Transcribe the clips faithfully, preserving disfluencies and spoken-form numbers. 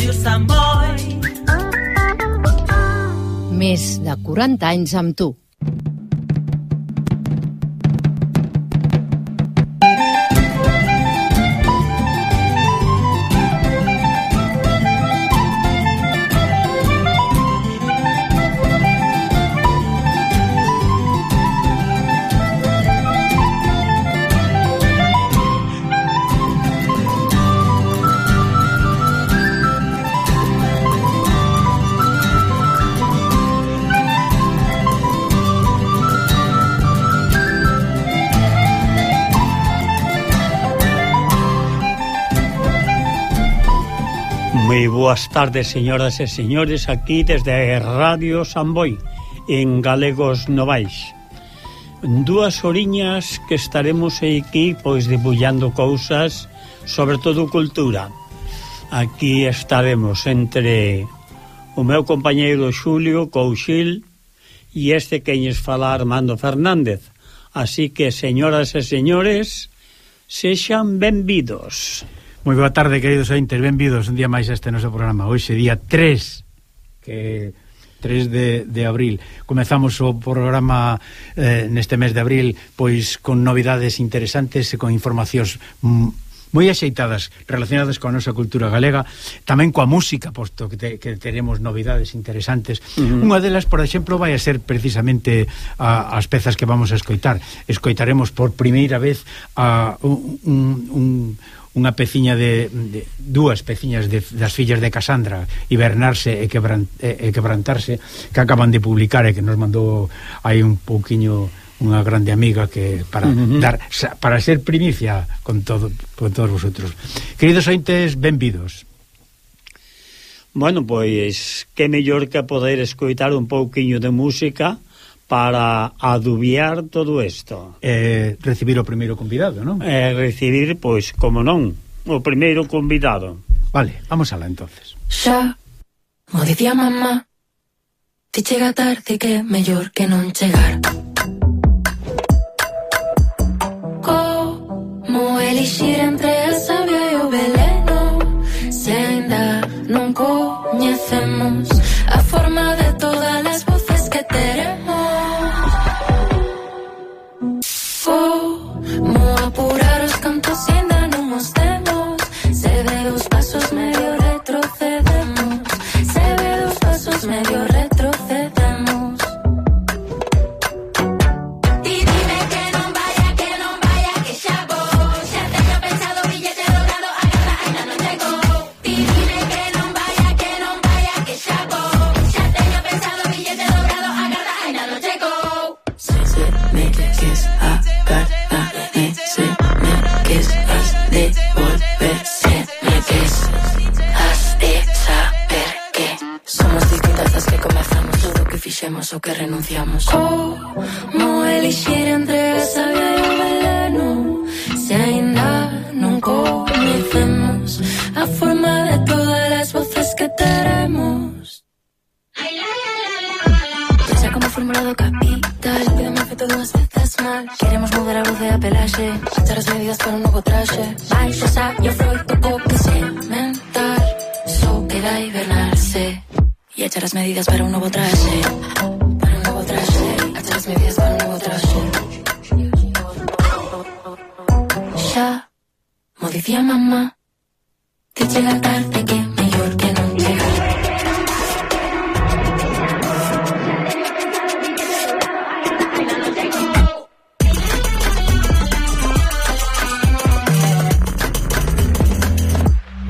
Ràdio Sant Boi. Més de quaranta anys amb tu. Moi boas tardes, señoras e señores, aquí desde Radio Sant Boi, en Galegos Novais. Dúas horiñas que estaremos aquí, pois, debullando cousas, sobre todo cultura. Aquí estaremos entre o meu compañeiro Xulio Couchil e este que lles fala Armando Fernández. Así que, señoras e señores, sexan benvidos. Moi boa tarde, queridos ointes, benvidos un día máis a este noso programa. Hoxe día tres, que tres de, de abril. Comezamos o programa eh, neste mes de abril, pois con novidades interesantes e con informacións moi axeitadas relacionadas coa nosa cultura galega, tamén coa música, posto que, te, que teremos novidades interesantes. Uh-huh. Unha delas, por exemplo, vai a ser precisamente a, as pezas que vamos a escoitar. Escoitaremos por primeira vez a un... un, un unha peciña de, de dúas peciñas de, das fillas de Casandra, Hibernarse e, quebran, e, e Quebrantarse, que acaban de publicar e que nos mandou aí un pouquiño unha grande amiga que para uh-huh. dar para ser primicia con todo con todos vosotros. Queridos ointes, benvidos. Bueno, pois que mellor que poder escoitar un pouquiño de música para adubiar todo isto. Eh, recibir o primeiro convidado, non? Eh, recibir, pois, como non, o primeiro convidado. Vale, vamos alá entonces. Xa, mo dicía mamá, ti chega tarde que mellor que non chegar. Como elixir entre a savia e o veleno, se ainda non coñecemos a forma de todas as voces que teremos. Como apurar os cantos e ainda non os temos. Se ve os pasos medio retrocedemos. Se ve os pasos medio retrocedemos. E dime que non vaya, que non vaya, que xa vou. Xa teño pensado billete dourado, agarra, ainda non chegou. E dime que non vaya, que non vaya, que xa vou. Xa teño pensado billete dourado, agarra, ainda non chegou. Se se me queres a fixemos o que renunciamos. Como elixir entre a savia e o veleno, se ainda non coñecemos a forma de todas as voces que teremos. Pensa como fórmula do capital, pídeme feito dúas veces mal. Queremos mudar a luz e a pelaxe, achar as medidas para un novo traxe. Baixo saio froito co que sementar, só queda hibernarse y echar as medidas para un novo traxe. Para un novo traxe, echar as medidas para un novo traxe. Xa, mo dicía mamá, que chega tarde que mellor que non chegar.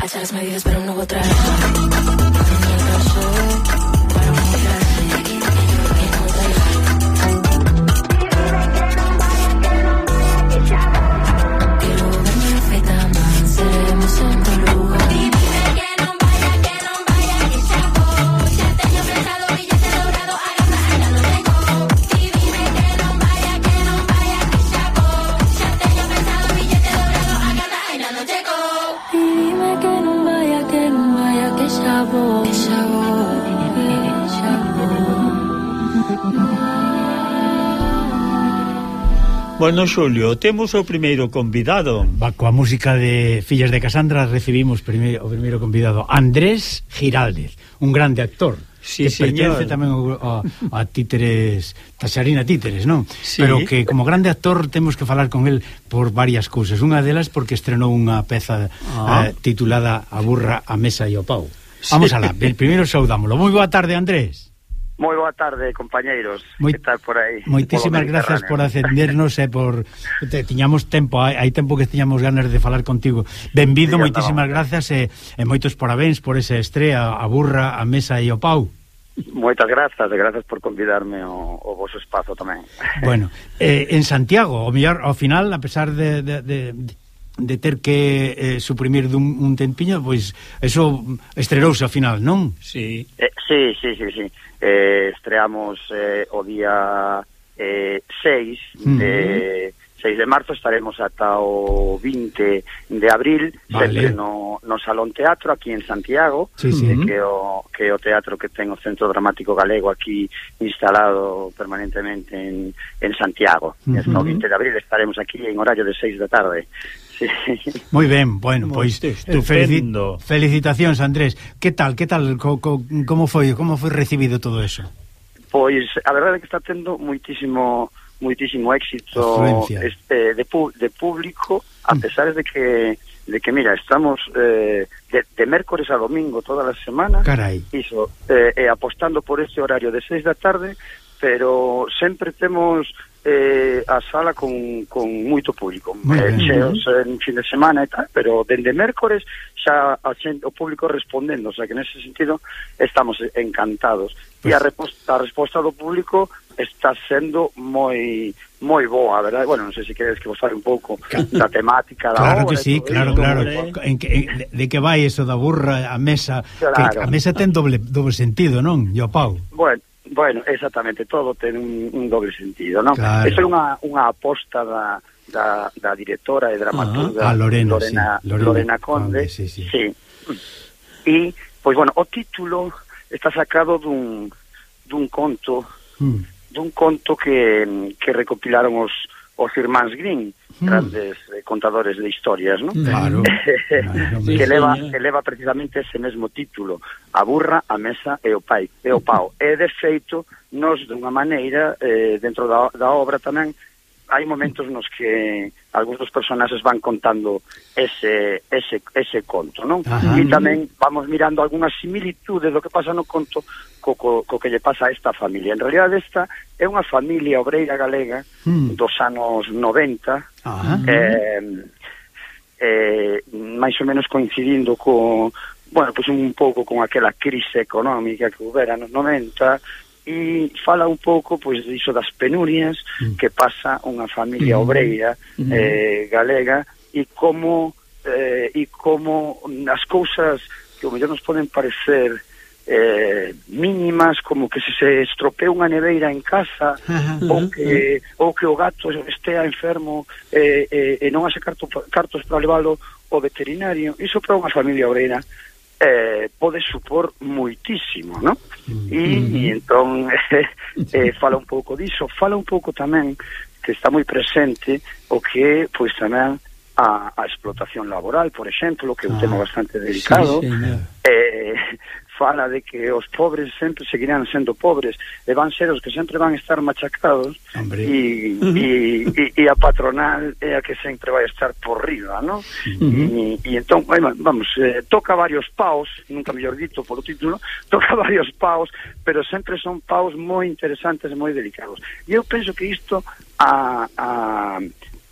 Echar as medidas para un novo traxe. Dime que non vaya, que non vaya, que xa Bueno, Xulio, temos o primeiro convidado. Va, coa música de Fillas de Casandra recibimos primeiro, o primeiro convidado, Andrés Giraldez, un grande actor. Sí, que señor. Pertence tamén a, a Títeres, Taxarina Títeres, non? Sí. Pero que como grande actor temos que falar con el por varias cousas. Unha delas porque estrenou unha peza ah. eh, titulada A burra, a mesa e o pau. Vamos sí. alá, primeiro saudámoslo. Moi boa tarde, Andrés. Moi boa tarde, compañeiros. Moi, que tal por aí? Moitísimas grazas por atendernos e por te, tiñamos tempo, hai, hai tempo que tiñamos ganas de falar contigo. Benvido, sí, moitísimas grazas e, e moitos parabéns por esa estrea, a burra, a mesa e o pau. Moitas grazas, e grazas por convidarme ao, ao vosso espazo tamén. Bueno, eh, en Santiago, o mellor, ao final, a pesar de, de, de, de ter que eh, suprimir dun un tempiño, pois eso estrerouse ao final, non? Sí. Eh, sí, sí, sí, sí. Eh, estreamos eh, o día eh, seis uh-huh. de seis de marzo, estaremos ata o vinte de abril, vale. Sempre no, no Salón Teatro aquí en Santiago, sí, sí. Eh, que o que o teatro que ten o Centro Dramático Galego aquí instalado permanentemente en, en Santiago. Uh-huh. Hasta o vinte de abril estaremos aquí en horario de seis da tarde. Sí. Moi ben, bueno, pois pues, felici felicitacións, Andrés. Que tal, que tal, co, co, como foi, como foi recibido todo eso? Pois a verdade é que está tendo moitísimo moitísimo éxito este de pu de público, a pesar de que de que mira, estamos eh, de, de mércores a domingo toda a semana. Carai. Iso, eh, eh, apostando por este horario de seis da tarde, pero sempre temos eh, a sala con, con moito público, eh, cheos en fin de semana e tal, pero dende mércores xa a xente, o público respondendo, o sea que nese sentido estamos encantados. Pues... E a resposta, a resposta do público está sendo moi moi boa, verdade? Bueno, non sei se queres que vos fale un pouco da temática da claro obra. Que sí, claro, claro. En que, en, de, de que vai eso da burra a mesa, claro. Que a mesa ten doble, doble sentido, non? E o pau. Bueno, Bueno, exactamente, todo ten un, un doble sentido, non? Claro. Esa é unha, unha aposta da, da, da directora e dramaturga ah, Lorena, Lorena, sí. Lorena, Lorena Conde. Conde, sí, sí. Sí. E, pois, bueno, o título está sacado dun, dun conto, mm. dun conto que, que recopilaron os, os irmáns Grimm, mm. grandes eh, contadores de historias, non? Claro. que, leva, que leva precisamente ese mesmo título, A burra, a mesa e o pai, e o pau. E, de feito, nos, dunha maneira, eh, dentro da, da obra tamén, hai momentos nos que algúns dos personaxes van contando ese, ese, ese conto, non? Ajá. E tamén vamos mirando algunhas similitudes do que pasa no conto co, co, co que lle pasa a esta familia. En realidad esta é unha familia obreira galega mm. dos anos noventa, eh, eh, máis ou menos coincidindo co, bueno, pues un pouco con aquela crise económica que houbera nos noventa, e fala un pouco pois diso das penurias mm. que pasa unha familia obreira mm. eh, galega e como eh, e como as cousas que ao mellor nos poden parecer eh, mínimas, como que se se estropea unha neveira en casa uh-huh. ou que ou que o gato estea enfermo eh, eh, e non haxe carto, cartos para leválo ao veterinario, iso para unha familia obreira Eh, pode supor moitísimo, non? E, mm-hmm. e entón eh, eh, fala un pouco diso, fala un pouco tamén que está moi presente o que, pois tamén a, a explotación laboral, por exemplo, que é un ah, tema bastante delicado, sí, eh, fala de que os pobres sempre seguirán sendo pobres e van ser os que sempre van estar machacados e, uh-huh. e, e, e a patronal é a que sempre vai estar por riba, non? Uh-huh. E, e entón, vamos, eh, toca varios paus, nunca mellor dito por o título, toca varios paus, pero sempre son paus moi interesantes e moi delicados. E eu penso que isto a... a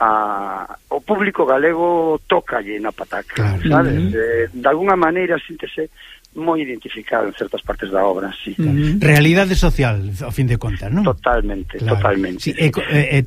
A, o público galego tócalle na pataca, claro. Sabes? Uh-huh. Eh, de alguna maneira síntese moi identificado en certas partes da obra, sí. Uh-huh. Realidade social, ao fin de contas, non? Totalmente, claro. Totalmente. Sí, e, e,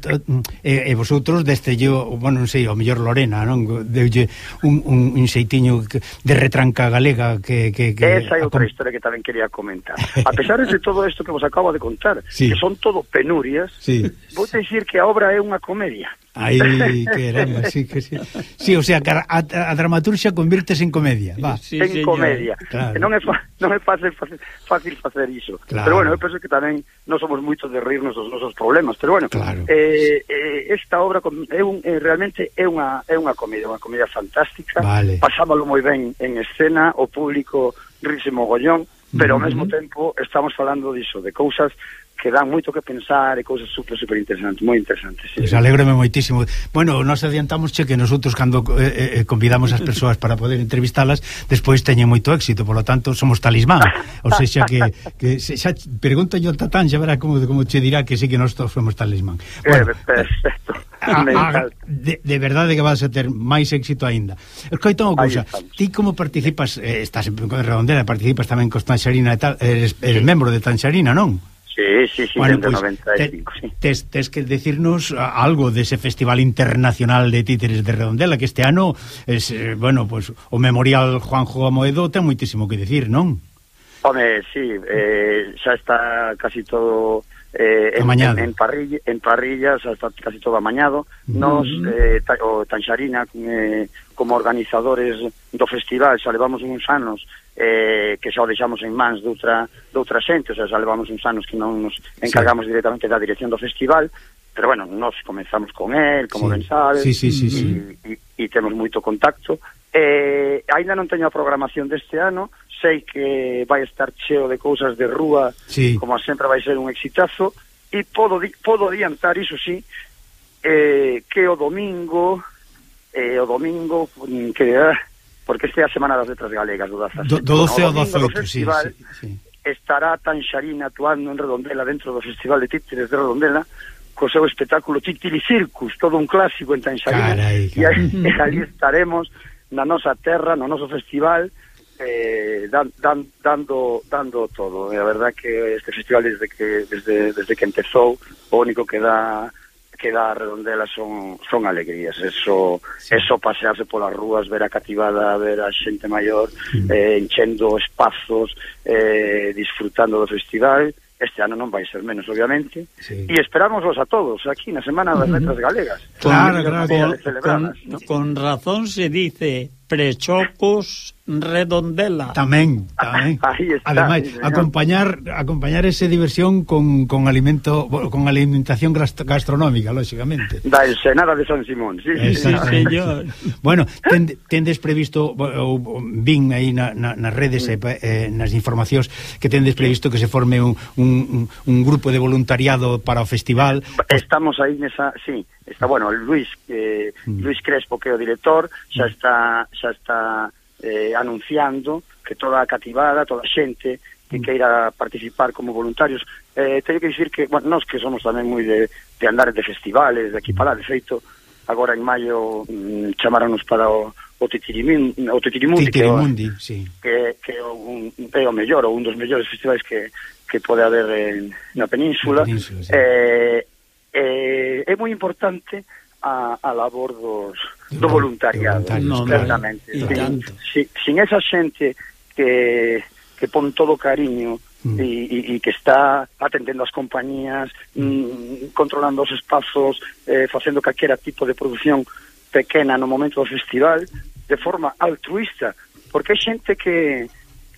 e, e vosotros deste yo, bueno, non sei, o mellor Lorena, non? Deulle un, un, un xeitiño de retranca galega que... que, que Esa é outra historia que tamén quería comentar. A pesar de todo isto que vos acabo de contar, sí. Que son todo penurias, sí. Vou dicir que a obra é unha comedia. Ai, que era, sí, que sí. Sí, o sea, que a, a, a dramaturgia convírtese en comedia, va. Sí, en señor. Comedia. Claro. Non é non é fácil facer, fácil facer iso. Claro. Pero bueno, eu penso que tamén non somos moitos de rirnos dos nosos problemas, pero bueno, claro. eh, eh, esta obra é un, eh, realmente é unha é unha comedia, unha comedia fantástica. Vale. Pasámoslo moi ben en escena, o público rise mogollón, pero uh-huh. ao mesmo tempo estamos falando diso, de cousas que dan moito que pensar e cousas super, super interesantes, moi interesantes. Sí. Pues alégrome moitísimo. Bueno, nos adiantamos che que nosotros cando eh, eh, convidamos as persoas para poder entrevistalas, despois teñen moito éxito, por lo tanto somos talismán. O sea, que, que se, xa pregunto yo a Tatán, xa verá como, como che dirá que sí que nós somos talismán. Bueno, eh, perfecto. A, a, de, de verdade que vas a ter máis éxito aínda. Escoita unha cousa, ti como participas, eh, estás en Redondela, participas tamén con Tanxarina e tal, eres, eres membro de Tanxarina, non? Sí, sí, sí, bueno, pues, noventa y cinco, te, sí. Tes, tes que decirnos algo dese Festival Internacional de Títeres de Redondela, que este ano es, eh, bueno, pues o Memorial Juanjo Amoedo ten moitísimo que decir, non? Home, sí, eh, xa está casi todo eh, en, en, en, parrilla, en parrilla, xa está casi todo amañado. Mm. Nos, eh, ta, o Tanxarina, eh, como organizadores do festival, xa levamos uns anos Eh, que xa o deixamos en mans de outra, de outra xente, o sea, xa levamos uns anos que non nos encargamos sí. directamente da dirección do festival, pero bueno, nos comenzamos con él, como sí. ben sabes, sí, sí, sí, sí. e temos moito contacto. Eh, ainda non teño a programación deste ano, sei que vai estar cheo de cousas de rúa, sí. como sempre vai ser un exitazo, e podo, podo adiantar, iso sí, eh, que o domingo, eh, o domingo, que... Ah, porque esta é a Semana das Letras Galegas do dezasete. Do doce ao dezaoito, sí, sí, sí. Estará Tanxarina actuando en Redondela dentro do Festival de Títeres de Redondela co seu espectáculo Titili Circus, todo un clásico en Tanxarina. Carai, carai. E, e ali estaremos na nosa terra, no noso festival, eh, dan, dan, dando dando todo. E a verdad que este festival desde que desde, desde que empezou, o único que dá que dá a Redondela son son alegrías, eso sí. eso pasearse polas rúas, ver a cativada, ver a xente maior mm. eh, enchendo espazos, eh, disfrutando do festival. Este ano non vai ser menos, obviamente, sí. e esperámoslos a todos aquí na Semana das Letras Galegas. Claro, claro, con, con, ¿no? con razón se dice Prechocos Redondela. Tamén, tamén. Ademais, sí, acompañar acompañar esa diversión con, con alimento con alimentación gastronómica, lógicamente. Da ensenada de San Simón, sí, sí, sí señor. Bueno, ten, tendes previsto, ou vin aí na, na, nas redes e eh, nas informacións que tendes previsto que se forme un, un, un grupo de voluntariado para o festival. Estamos aí nesa, sí. Está, bueno, Luis eh, mm. Luis Crespo, que é o director, xa está xa está eh, anunciando que toda a cativada, toda a xente que queira participar como voluntarios, eh, teño que dicir que, bueno, nós que somos tamén moi de, de andar de festivales, de aquí para lá, de feito, agora en maio mm, chamaronos para o, o Titirimundi, o Titirimundi, Titirimundi, que, sí. que, que un, é o mellor, ou un dos mellores festivais que, que pode haber en, na península, península sí. eh, Eh, é moi importante a, a labor dos, do voluntariado, no, certamente. No, sin, sin, sin esa xente que, que pon todo cariño mm. e, e, e que está atendendo as compañías, mm, controlando os espazos, eh, facendo calquera tipo de produción pequena no momento do festival, de forma altruista, porque é xente que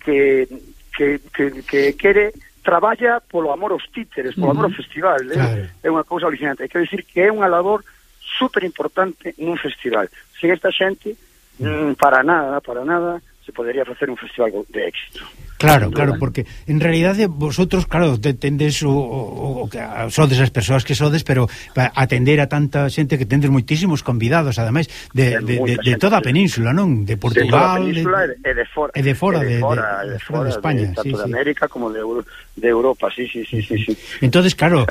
que, que, que, que quere traballa polo amor aos títeres, polo amor ao festival, eh? Claro. É unha cousa alucinante. Quero dicir que é unha labor super importante nun festival. Sin esta xente, mm, para nada, para nada, se podería facer un festival de éxito. Claro, claro, porque en realidade vosotros, claro, tendes o, o, o que sodes as persoas que sodes, pero para atender a tanta xente que tendes moitísimos convidados, ademais de, de, de, de toda a península, non? De Portugal, de toda a península e de fora, e de fora de, de, fora, de, de, de, fora, de España, de, tanto sí, de sí. América como de, de Europa, sí, sí, sí, sí, sí. Entonces, claro,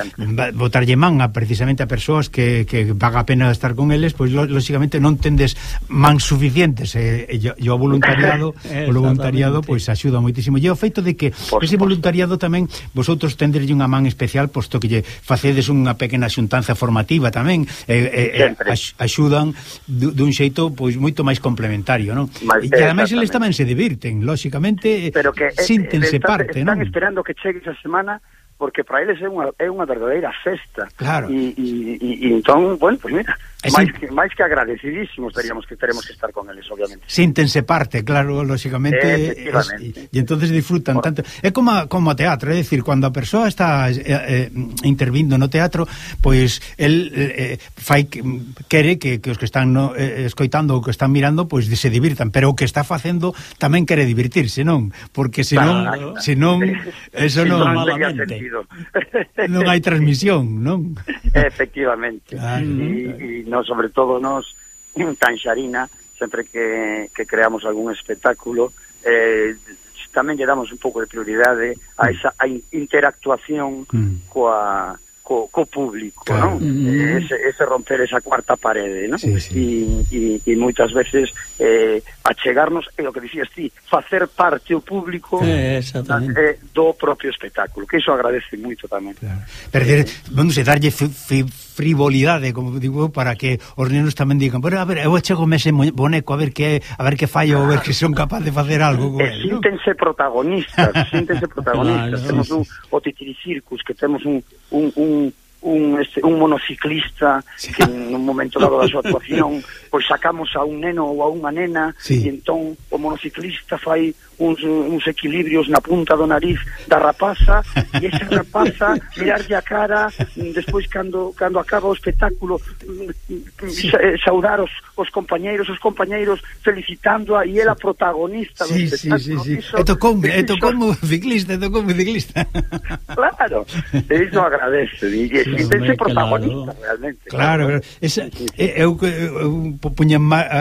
botarlle man a precisamente a persoas que, que vaga a pena estar con eles, pois pues, lógicamente non tendes man suficientes, e, e, e o voluntariado, o voluntariado pois pues, axuda moitísimo. E o feito de que Por ese voluntariado tamén vosotros tenderlle unha man especial, posto que lle facedes unha pequena xuntanza formativa tamén, e, e, axudan dun xeito pois moito máis complementario, non? Mas, e ademais eles tamén se divirten, lóxicamente, pero que síntense están, parte, están non? Esperando que chegue esa semana porque para eles é unha, é unha verdadeira festa. Claro. E, e, e, e entón, bueno, pues mira, é máis, sin... que, máis que agradecidísimos teríamos que teremos que estar con eles, obviamente. Síntense parte, claro, lógicamente, efectivamente. E entonces disfrutan tanto. É como como o teatro, é dicir, cando a persoa está eh, eh, intervindo no teatro, pois el eh, fai quere que, que os que están no, eh, escoitando ou que están mirando, pois se divirtan, pero o que está facendo tamén quere divertirse, non? Porque senón, claro, senón eso non, non tería sentido. Non hai transmisión, non? Efectivamente. Claro. E, e no, sobre todo nos en Tanxarina, sempre que, que creamos algún espectáculo, eh, tamén lle damos un pouco de prioridade a esa a interactuación mm. coa Co, co público, claro. Non? Mm. Ese, ese romper esa cuarta parede, non? Sí, sí. E, e, e moitas veces eh, achegarnos, é o que dicías ti, facer parte o público eh, eh, do propio espectáculo, que iso agradece moito tamén. Claro. Pero, eh, vamos a darlle f, f, frivolidade, como digo, para que os nenos tamén digan, bueno, a ver, eu achegome ese boneco a ver que a ver que fallo, a ver que son capaz de facer algo con eh, él, síntense ¿no? protagonistas, síntense protagonistas. Claro, temos sí, un, o Titiri Circus, que temos un un, un un, este, un monociclista sí. que nun momento dado da súa actuación pois sacamos a un neno ou a unha nena sí. e entón o monociclista fai uns, uns equilibrios na punta do nariz da rapaza e esa rapaza mirarlle a cara despois cando, cando acaba o espectáculo sí. saudar os, os compañeiros os compañeiros felicitándoa e ela protagonista sí, do espectáculo sí, sí, sí. e tocoume, e tocoume ciclista e tocoume ciclista claro, iso agradece e sí, sentense protagonista claro. realmente claro, claro. Esa, sí, sí. eu, eu, eu puña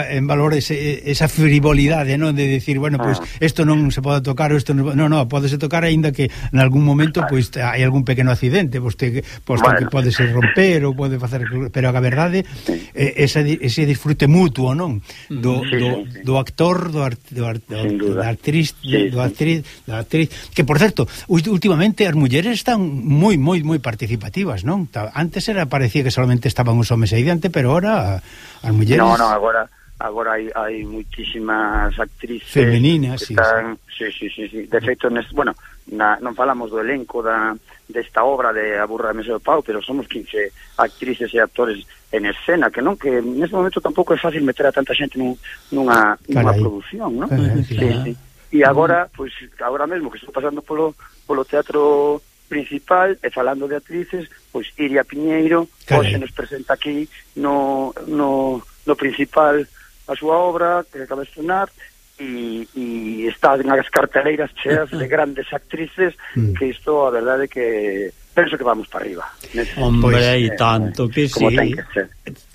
en valor ese, esa frivolidade, non, de decir, bueno, pois pues, isto ah. non se pode tocar, isto non, no, no, podese tocar aínda que en algún momento pois pues, hai algún pequeno accidente, pois pues, pues, bueno. que pode ser romper ou pode facer, pero a verdade sí. eh, esa, ese disfrute mutuo, non? Do, sí, do, sí, sí. do actor, do, art, do, art, do, do actriz, sí, do actriz, sí. da actriz, que por certo, últimamente as mulleres están moi moi moi participativas, non? Antes era parecía que solamente estaban os homes aí diante, pero ahora as mulleres... No, no, agora agora hai, hai muitísimas actrices femeninas, que están, sí, sí, sí, sí. De feito, nes, bueno, na, non falamos do elenco da desta obra de A burra de Mesa e o Pau, pero somos quince actrices e actores en escena, que non, que neste momento tampouco é fácil meter a tanta xente nun, nunha, nunha produción, non? Carai, sí, sí. E agora, pois, pues, agora mesmo que estou pasando polo, polo teatro principal e falando de actrices, pois Iria Piñeiro hoxe nos presenta aquí no, no, no principal a súa obra que acaba de estrenar e, e está nas carteleiras cheas de grandes actrices mm. que isto a verdade que penso que vamos para arriba. Hombre, pois, e tanto que como sí. ten que ser.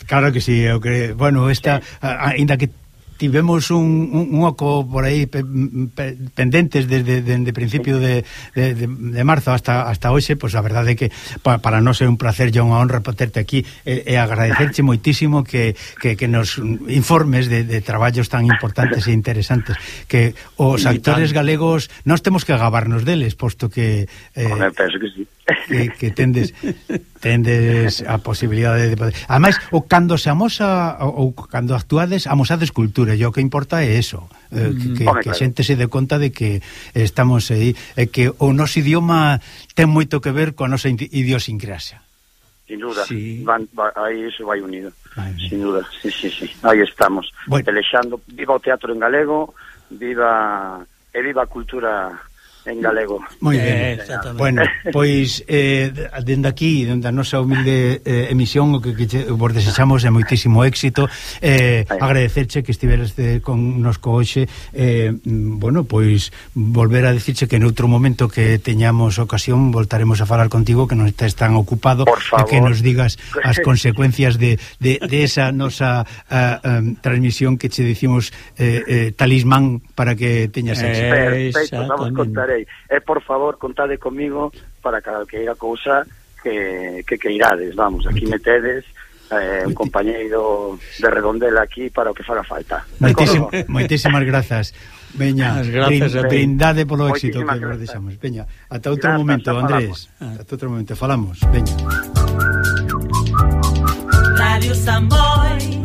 Claro que sí, eu creo, bueno, esta sí. Ainda que tivemos un, un, un oco por aí pe, pe, pendentes desde de, de principio de, de, de, de marzo hasta hasta hoxe, pois pues a verdade é que pa, para nós é un placer e unha honra poterte aquí e, e agradecerche moitísimo que, que, que nos informes de, de traballos tan importantes e interesantes que os actores galegos nós temos que agabarnos deles, posto que eh, Hombre, penso que sí. que, que tendes tendes a posibilidade de poder. Ademais, o cando se amosa ou cando actuades, amosades cultura, e o que importa é eso, eh, que, que, Hombre, que a xente se dé conta de que estamos aí, e que o noso idioma ten moito que ver coa nosa idiosincrasia. Sin duda, sí. van, va, aí iso vai unido. Ay, sin duda, sí, sí, sí. Aí estamos, bueno. Pelexando, viva o teatro en galego, viva e viva a cultura en galego. Moi ben. Eh, bueno, pois eh, dende aquí, dende a nosa humilde eh, emisión, o que, que vos desexamos é moitísimo éxito, eh, agradecerche que estiveras de, con nos co hoxe, eh, bueno, pois volver a dicirche que noutro momento que teñamos ocasión voltaremos a falar contigo, que non estés tan ocupado, e que nos digas as consecuencias de, de, de esa nosa uh, um, transmisión que che dicimos eh, eh, talismán para que teñas éxito. Eh, Perfecto, vamos contar. E por favor, contade comigo para calqueira cousa que, que queirades, vamos, aquí metedes eh, un compañeiro de Redondela aquí para o que faga falta. Moitísim, moitísimas grazas. Veña, grazas, brindade polo éxito que nos deixamos. Veña, ata outro grazas, momento, Andrés. Ata outro momento, falamos. Veña. Radio Samboy.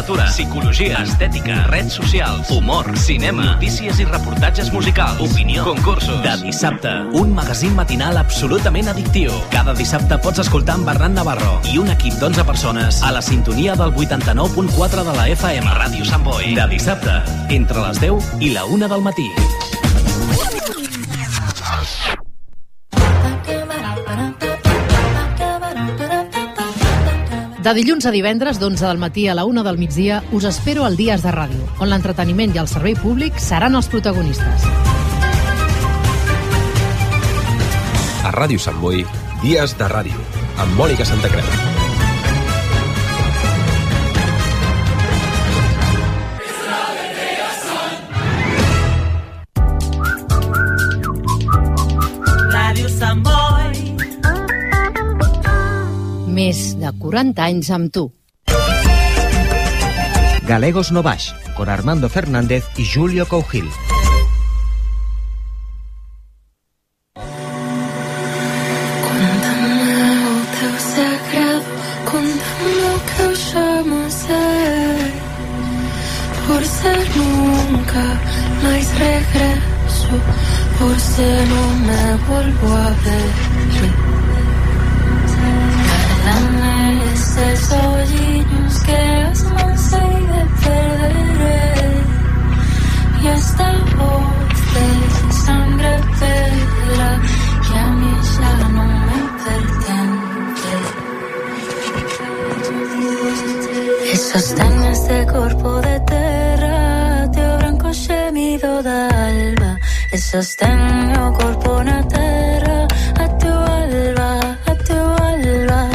literatura, psicologia, estètica, redes socials, humor, cinema, notícies i reportatges musicals, opinió, concursos. De dissabte, un magazín matinal absolutament addictiu. Cada dissabte pots escoltar en Bernat Navarro i un equip d'onze persones a la sintonia del vuitanta-nou punt quatre de la F M. Ràdio Sant Boi. De dissabte, entre les deu i la una del matí. De dilluns a divendres, d'onze del matí a la una del migdia, us espero al Dies de Ràdio, on l'entreteniment i el servei públic seran els protagonistes. A Ràdio Sant Boi, Dies de Ràdio, amb Mònica Santacreu. Ràdio Sant Boi. Més de quaranta anys amb tu. Galegos no Baix, con Armando Fernández y Julio Cougil. Conta'm el teu segredo, conta'm lo que usamos ser. Por ser nunca más regreso, por ser no me vuelvo a ver. Dame esos hoyitos que has mansei de perder. Y esta voz de sangre pedra que a mí ya no me pertenece. E sostén este corpo de terra, teu branco xemido da alba. E sostén o corpo na terra, a teu alba, a teu alba.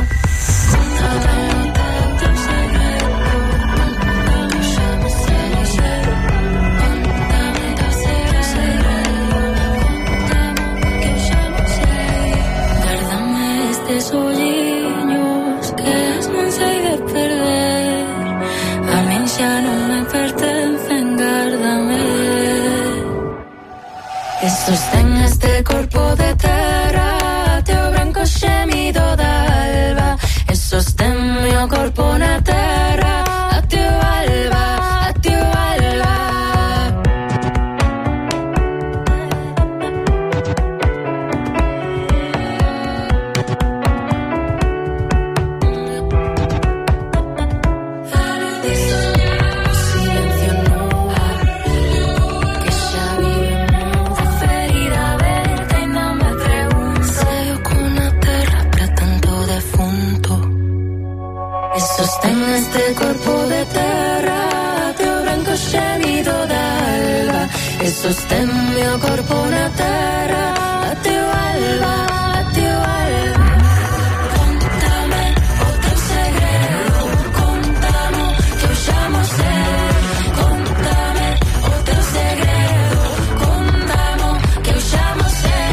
Olliños que es mansei de perder, a min xa non me pertencen, gárdame. E sostén este corpo de terra, teu branco xemido da alba. E sostén meu corpo na terra, a teu alba, a teu alba. Sostén este corpo de terra, teu branco xemido da alba. E sostén meu corpo na terra, a teu alba, a teu alba. Contame o teu segredo, contame que eu xa mo sei. Contame o teu segredo, contame que eu xa mo sei.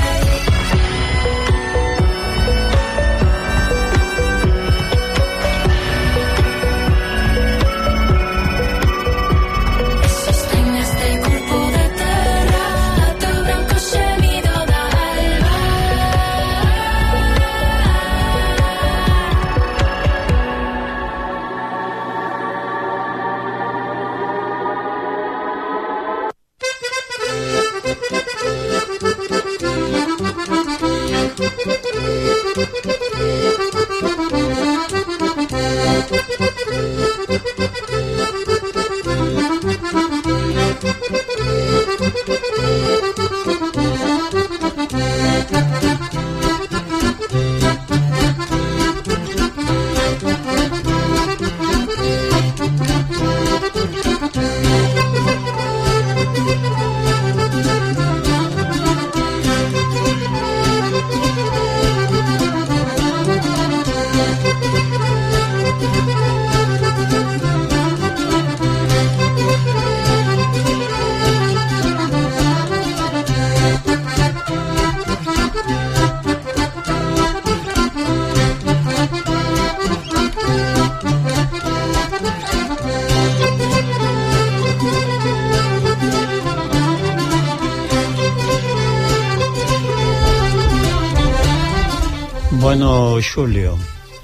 Bueno, Xulio,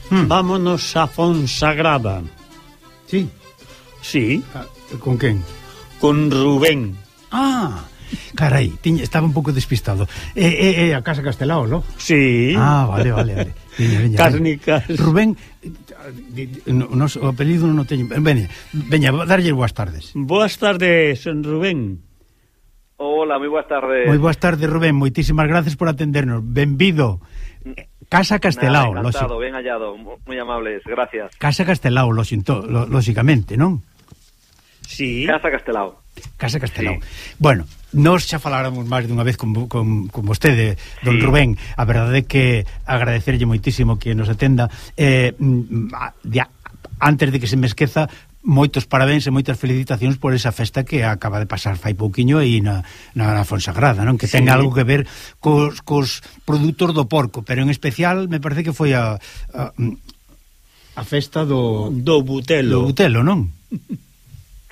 hmm. vámonos a Fonsagrada. Sí. Sí. Con quen? Con Rubén. Ah, carai, tiña, estaba un pouco despistado. É eh, eh, eh, a Casa Castelao, non? Sí. Ah, vale, vale, vale. Veña, veña, Cárnicas. Veña. Rubén, no, no, o apelido non o teño. Veña, veña, darlle boas tardes. Boas tardes, Rubén. Hola, moi boas tardes. Moi boas tardes, Rubén. Moitísimas gracias por atendernos. Benvido. Casa Castelao, Nada, encantado, ben hallado, moi amables, gracias. Casa Castelao, lo sinto, lo, lógicamente, non? Sí. Casa Castelao. Casa Castelao. Sí. Bueno, nós xa faláramos máis dunha vez con, con, con vostede, don sí. Rubén. A verdade é que agradecerlle moitísimo que nos atenda. Eh, ya, antes de que se me esqueza, moitos parabéns e moitas felicitacións por esa festa que acaba de pasar fai pouquiño aí na, na, na Fonsagrada, non? Que ten sí. algo que ver cos, cos produtos do porco, pero en especial me parece que foi a a, a festa do do butelo. Do butelo, non?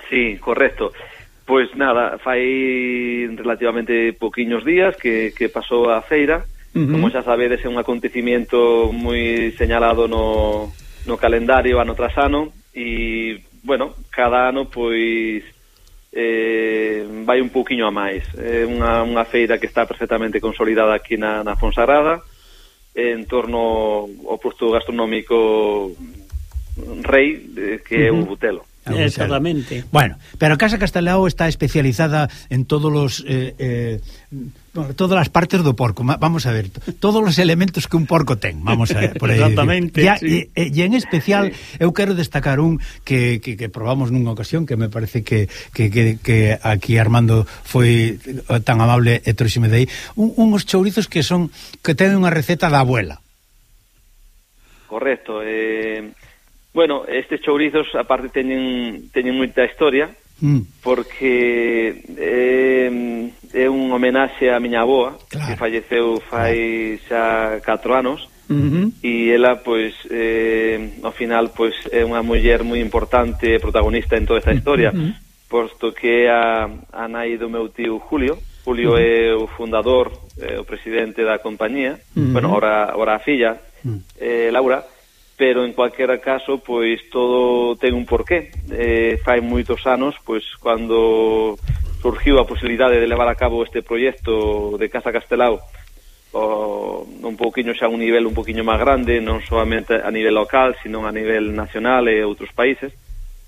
Sí, correcto. Pois nada, fai relativamente pouquiños días que, que pasou a feira. Uh-huh. Como xa sabedes, é un acontecimiento moi señalado no, no calendario ano tras ano e bueno, cada ano pois eh, vai un pouquiño a máis. É unha, unha feira que está perfectamente consolidada aquí na, na Fonsagrada en torno ao posto gastronómico rei que é uh-huh. o butelo. Exactamente. Bueno, pero a Casa Castelao está especializada en todos los eh, eh, todas as partes do porco. Vamos a ver, todos os elementos que un porco ten, vamos a ver por aí. Exactamente. Ya, sí. e, e en especial sí. eu quero destacar un que, que, que probamos nunha ocasión que me parece que, que, que, que aquí Armando foi tan amable e trouxeme de aí, un, uns chourizos que son que teñen unha receta da abuela. Correcto, eh bueno, estes chourizos aparte teñen teñen moita historia mm. porque eh, é un homenaxe a miña avoa claro. que falleceu fai xa catro anos uh-huh. e ela pois eh, ao final pois é unha muller moi importante protagonista en toda esta historia uh-huh. posto que é a, a nai do meu tío Julio. Julio uh-huh. é o fundador, é o presidente da compañía, uh-huh. bueno, ora, ora a filla uh-huh. eh, Laura. Pero en cualquier caso, pois todo ten un porqué. Eh, fai moitos anos, pois cando surgiu a posibilidade de levar a cabo este proxecto de Casa Castelao o, un pouquiño xa a un nivel un pouquiño máis grande, non solamente a nivel local, sino a nivel nacional e outros países,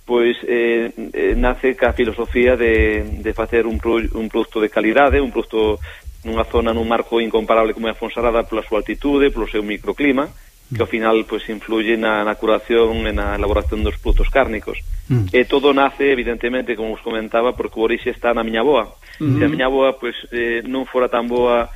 pois eh, eh, nace ca filosofía de, de facer un, pro, un produto de calidade, un produto nunha zona, nun marco incomparable como é a Fonsagrada pola súa altitude, polo seu microclima, que ao final pois influye na, na curación e na elaboración dos produtos cárnicos. Mm. E todo nace, evidentemente, como os comentaba, porque o orixe está na miña avoa. Mm. Se a miña avoa pois, eh, non fora tan boa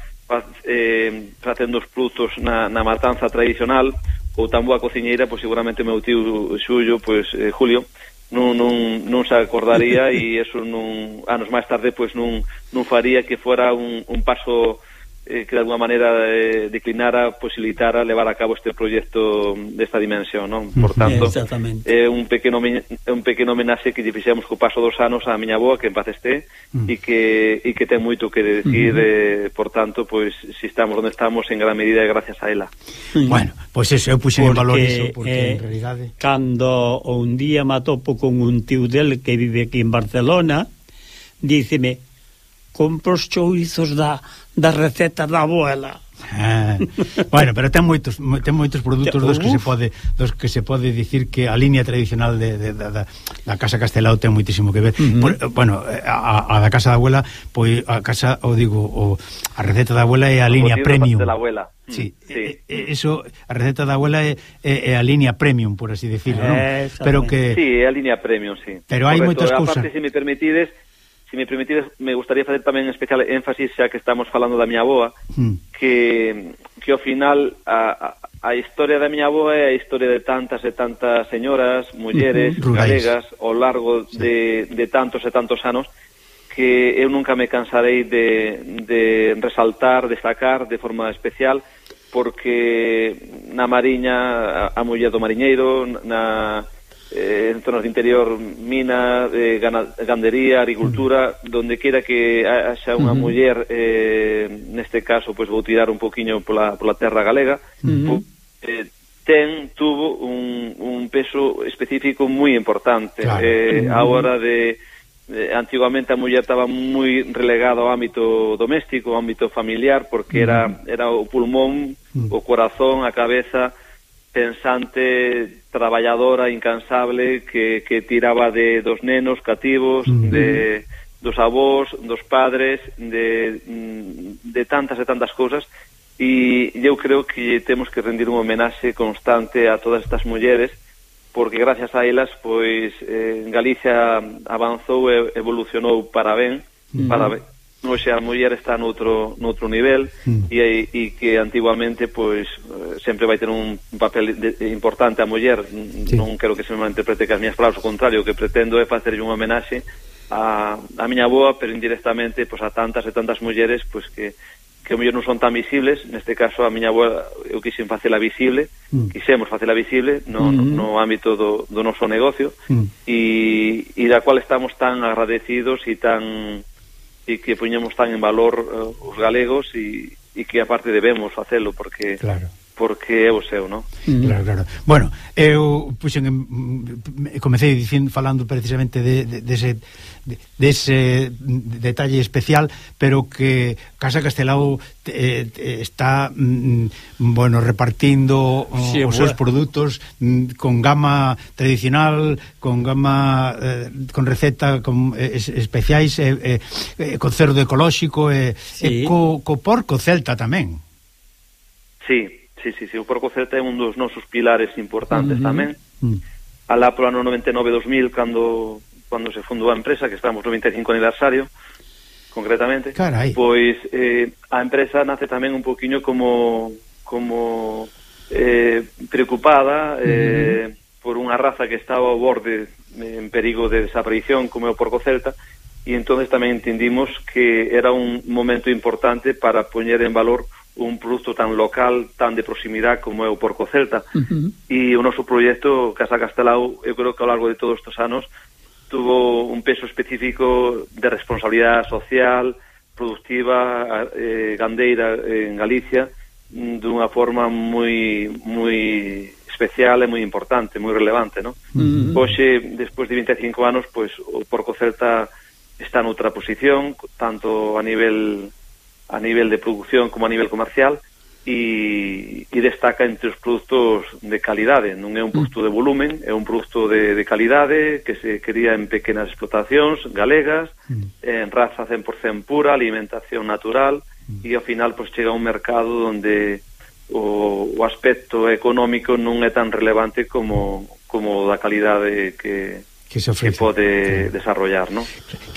eh, facendo os produtos na, na matanza tradicional ou tan boa cociñeira, pois seguramente o meu tío Xulio, pois eh, Julio, non, non, non se acordaría e eso non, anos máis tarde pois non, non faría que fora un, un paso Eh, que de alguma maneira eh, declinara, posibilitara levar a cabo este proxecto desta dimensión, non? Por tanto, é un pequeno é un pequeno homenaxe que lle fixemos co paso dos anos á miña avoa, que en paz este, mm. e que e que ten moito que decir, mm. eh, por tanto, pois si estamos onde estamos en gran medida é gracias a ela. Mm. Bueno, pois eso, eu puxen en valor iso, porque eh, en realidade cando un día me atopo con un tío del que vive aquí en Barcelona, díceme: compro os chourizos da, da receta da abuela. Ah, bueno, pero ten moitos ten moitos produtos dos que se pode dos que se pode dicir que a línea tradicional de, de, de, de da Casa Castelao ten moitísimo que ver. Uh-huh. Por, bueno, a, a da casa da abuela, pois a casa, o digo, o, a receta da abuela é a línea premium. De la abuela. Sí, sí. E, eso, a receta da abuela é, é, é a línea premium, por así decirlo, ¿no? Pero que sí, é a línea premium, sí. Pero hai moitas cousas. Aparte, se me permitides, se me permitides, me gustaría facer tamén especial énfasis, xa que estamos falando da miña avoa, mm. que, que ao final a, a, a historia da miña avoa é a historia de tantas e tantas señoras, mulleres, uh-huh. galegas, ao largo sí. de, de tantos e tantos anos, que eu nunca me cansarei de, de resaltar, destacar de forma especial, porque na Mariña, a, a muller do mariñeiro, na... Eh, en zonas de interior, mina, eh, gandería, agricultura, uh-huh. donde quera que haxa unha uh-huh. muller, eh, neste caso, pois vou tirar un poquinho pola, pola terra galega, uh-huh. po, eh, ten, tuvo un, un peso específico moi importante. Claro. Eh, a hora de... Eh, antiguamente a muller estaba moi relegada ao ámbito doméstico, ao ámbito familiar, porque era, era o pulmón, o corazón, a cabeza pensante, traballadora, incansable, que, que tiraba de dos nenos cativos, uh-huh. de dos avós, dos padres, de, de tantas e tantas cousas, e eu creo que temos que rendir un homenaxe constante a todas estas mulleres, porque gracias a elas, pois, eh, Galicia avanzou e evolucionou para ben, uh-huh. para ben. Hoxe a muller está noutro, noutro nivel, uh-huh. e, e que antiguamente, pois, sempre vai ter un papel de, de, importante a muller. Sí. Non quero que se me malinterprete que as miñas palabras, o contrario, o que pretendo é facerlle un homenaxe a, a miña avoa, pero indirectamente, pois, a tantas e tantas mulleres, pois, que que o mellor non son tan visibles. Neste caso a miña avoa eu quixen facela visible, mm. quixemos facela visible no, mm. no, no ámbito do, do noso negocio, mm. e, e da cual estamos tan agradecidos e tan e que poñemos tan en valor uh, os galegos, e, e que aparte debemos facelo porque claro. porque é o seu, non? Mm. Claro, claro. Bueno, eu puxen en, comecei dicindo, falando precisamente de, de, de ese de, de ese detalle especial, pero que Casa Castelao eh, está mm, bueno, repartindo sí, os seus produtos mm, con gama tradicional, con gama eh, con receta con, eh, especiais, eh, eh, con cerdo ecolóxico, e eh, sí. eh, co, co porco celta tamén. Sí. Sí, sí, sí, o porco celta é un dos nosos pilares importantes uh-huh. tamén. Uh-huh. Alá pro ano noventa e nove dos mil, cando cando se fundou a empresa, que estamos no noventa e cinco aniversario, concretamente, Carai. pois eh, a empresa nace tamén un poquinho como como eh, preocupada eh, uh-huh. por unha raza que estaba ao borde en perigo de desaparición, como é o porco celta, e entonces tamén entendimos que era un momento importante para poñer en valor un produto tan local, tan de proximidade como é o porco celta. Uh-huh. E o noso proxecto Casa Castelao, eu creo que ao largo de todos estes anos tuvo un peso específico de responsabilidade social, productiva, eh, gandeira en Galicia, dunha forma moi moi especial e moi importante, moi relevante, non? Uh-huh. Hoxe, despois de vinte e cinco anos, pois o porco celta está noutra posición, tanto a nivel a nivel de producción como a nivel comercial, e, e destaca entre os produtos de calidade. Non é un produto de volumen, é un produto de, de calidade que se cría en pequenas explotacións galegas, en raza cen por cento pura, alimentación natural, e ao final pues, chega a un mercado onde o, o aspecto económico non é tan relevante como, como da calidade que que se ofrece, que pode sí. desarrollar, ¿no?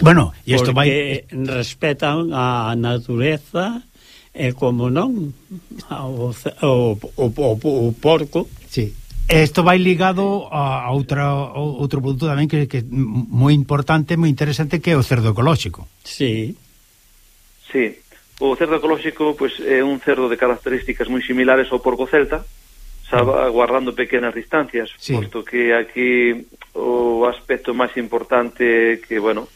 Bueno, e isto vai... vai... respetan a natureza e, como non, o, o, o, o, o porco. Sí. Isto vai ligado a outra, a outro produto tamén que, que é moi importante, moi interesante, que é o cerdo ecolóxico. Sí. Sí. O cerdo ecolóxico pues, é un cerdo de características moi similares ao porco celta, xa guardando pequenas distancias, sí. Posto que aquí o aspecto máis importante que, bueno,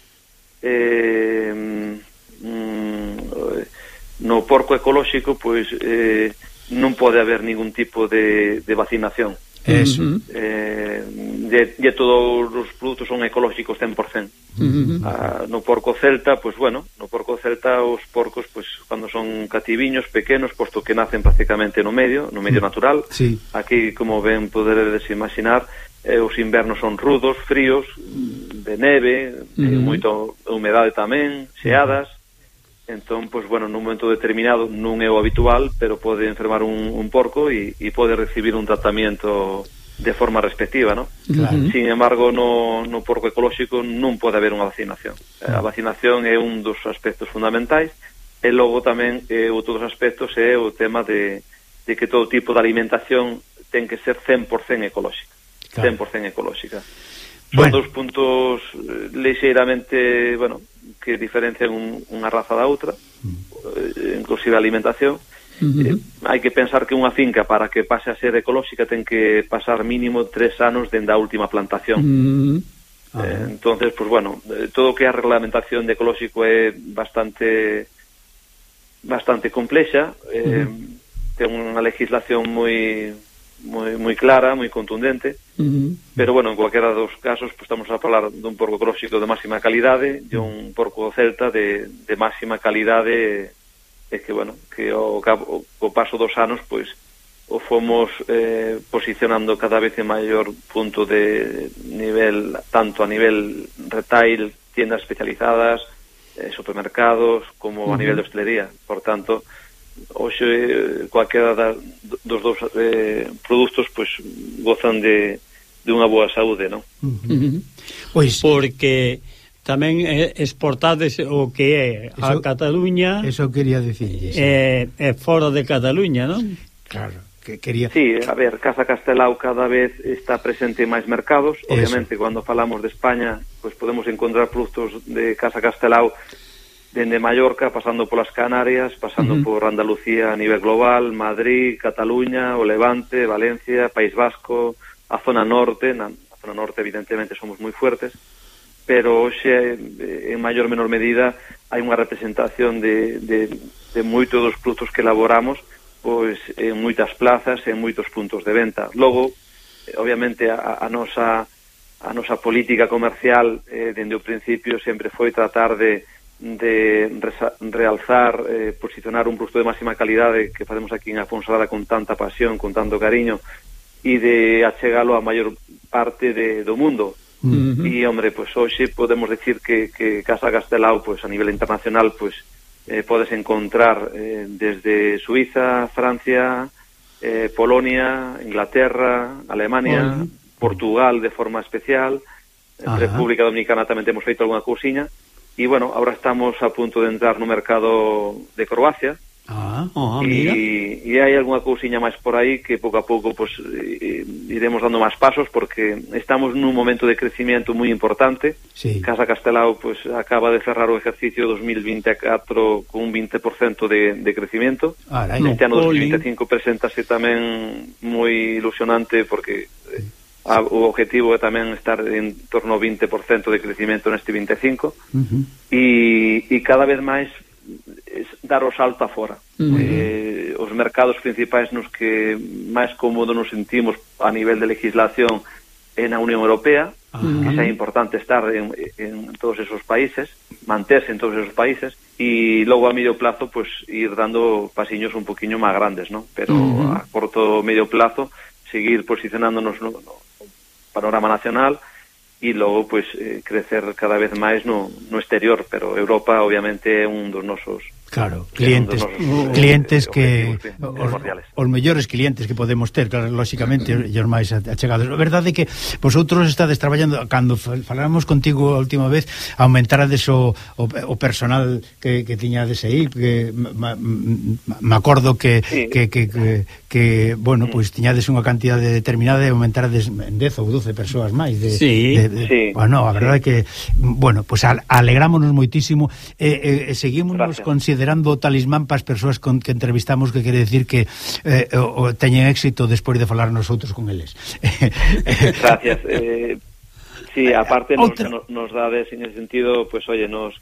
eh, mm, no porco ecolóxico, pois eh, non pode haber ningún tipo de, de vacinación. Eso. Eh, de, de todos os produtos son ecolóxicos cen por cento. Uh-huh. Ah, no porco celta, pois bueno, no porco celta os porcos, pois cando son cativiños pequenos, posto que nacen prácticamente no medio, no medio natural. Sí. Aquí, como ben poderedes imaginar, eh, os invernos son rudos, fríos, de neve, uh-huh. eh, moito humedade tamén, xeadas. Entón, pois bueno, nun momento determinado non é o habitual, pero pode enfermar un, un porco e, e pode recibir un tratamento de forma respectiva, ¿no? Claro. Sin embargo, no, no porco ecolóxico non pode haber unha vacinación. A vacinación é un dos aspectos fundamentais, e logo tamén eh, outro dos aspectos é o tema de, de que todo tipo de alimentación ten que ser cen por cento ecolóxica. Claro. cen por cento ecolóxica. Son bueno. dos puntos lixeiramente, bueno, que diferencian un, unha raza da outra, mm. inclusive a alimentación. Uh-huh. eh, hai que pensar que unha finca, para que pase a ser ecolóxica, ten que pasar mínimo tres anos dende a última plantación. Uh-huh. Uh-huh. Eh, entonces, pues bueno, todo o que é a reglamentación de ecolóxico é bastante bastante complexa, eh, uh-huh. ten unha legislación moi moi, moi clara, moi contundente, uh-huh. pero bueno, en cualquiera dos casos pues, estamos a falar dun porco cróxico de máxima calidade e un porco celta de, de máxima calidade, e que bueno, que ao, cabo, ao paso dos anos pois o fomos eh, posicionando cada vez en maior punto de nivel, tanto a nivel retail, tiendas especializadas, eh, supermercados, como uh-huh. a nivel de hostelería. Por tanto, hoxe cualquiera da, dos dous eh, produtos pois gozan de, de unha boa saúde, non? Uh-huh. Pois porque tamén exportades o que é a eso, Cataluña. Eso quería dicir. É, é fora de Cataluña, non? Claro. Que quería... Sí, a ver, Casa Castelao cada vez está presente en máis mercados. Eso. Obviamente, cando falamos de España, pues podemos encontrar produtos de Casa Castelao dende Mallorca, pasando polas Canarias, pasando uh-huh. por Andalucía a nivel global, Madrid, Cataluña, o Levante, Valencia, País Vasco, a zona norte. Na zona norte, evidentemente, somos moi fuertes, pero hoxe, en maior ou menor medida, hai unha representación de, de, de moitos dos produtos que elaboramos pois en moitas plazas, en moitos puntos de venta. Logo, obviamente, a, a nosa a nosa política comercial eh, dende o principio sempre foi tratar de, de resa, realzar, eh, posicionar un produto de máxima calidade que facemos aquí en Afonsalada con tanta pasión, con tanto cariño, e de achegalo a maior parte de, do mundo. Uh-huh. E, hombre, pois hoxe podemos decir que, que Casa Castelao, pois a nivel internacional, pois Eh, podes encontrar eh, desde Suiza, Francia, eh, Polonia, Inglaterra, Alemania, uh-huh. Portugal de forma especial, uh-huh. República Dominicana tamén temos feito algunha cousiña, e bueno, ahora estamos a punto de entrar no mercado de Croacia, ah, oh, e, e hai algunha cousiña máis por aí que pouco a pouco pues, eh, iremos dando máis pasos, porque estamos nun momento de crecimiento moi importante. Sí. Casa Castelao pues, acaba de cerrar o ejercicio dos mil veinticuatro con un veinte por ciento de, de crecimiento. Ah, este ano dos mil veinticinco preséntase tamén moi ilusionante, porque eh, a, o objetivo é tamén estar en torno ao veinte por ciento de crecimiento neste veinticinco, uh-huh. e, e cada vez máis dar o salto afora. Uh-huh. Eh, os mercados principais nos que máis cómodo nos sentimos a nivel de legislación é na Unión Europea, uh-huh. que xa é importante estar en, en todos esos países, manterse en todos esos países, e logo a medio plazo pues ir dando pasiños un poquinho máis grandes, ¿no? Pero uh-huh. a corto medio plazo seguir posicionándonos no, no panorama nacional, e logo pues eh, crecer cada vez máis no, no exterior, pero Europa obviamente é un dos nosos Claro, clientes nosos, clientes eh, que os, os mellores clientes que podemos ter, claro, lóxicamente e os máis achegados. A verdade é que vosotros estades traballando, cando falamos contigo a última vez, aumentarades o, o, o personal que, que tiñades aí, que me acordo que, sí. que, que, que, que bueno, pois pues, tiñades unha cantidade determinada e aumentarades en dez ou doce persoas máis de, sí, de, de, sí. Bueno, a verdade é que bueno, pois pues, alegrámonos moitísimo e, e, e seguímonos considerando considerando o talismán para as persoas con que entrevistamos, que quere decir que eh, o, o teñen éxito despois de falar nosotros con eles. Gracias. Eh, sí, aparte nos, nos, nos dades en ese sentido, pues oye, nos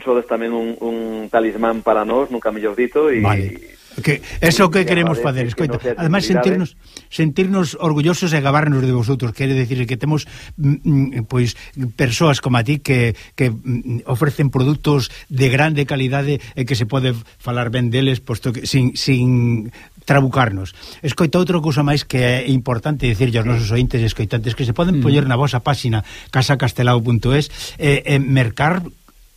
sodes tamén un, un talismán para nós, nunca mellor dito, e vale. Que eso que queremos facer, escoita. Ademais sentirnos sentirnos orgullosos e gabarnos de vosotros, quere decir que temos mm, pois persoas como a ti que que mm, ofrecen produtos de grande calidade e que se pode falar ben deles, posto que sin sin trabucarnos. Escoita, outra cousa máis que é importante dicirlle aos nosos ointes e escoitantes, que se poden mm. poñer na vosa páxina casa castelao punto es e eh, eh, mercar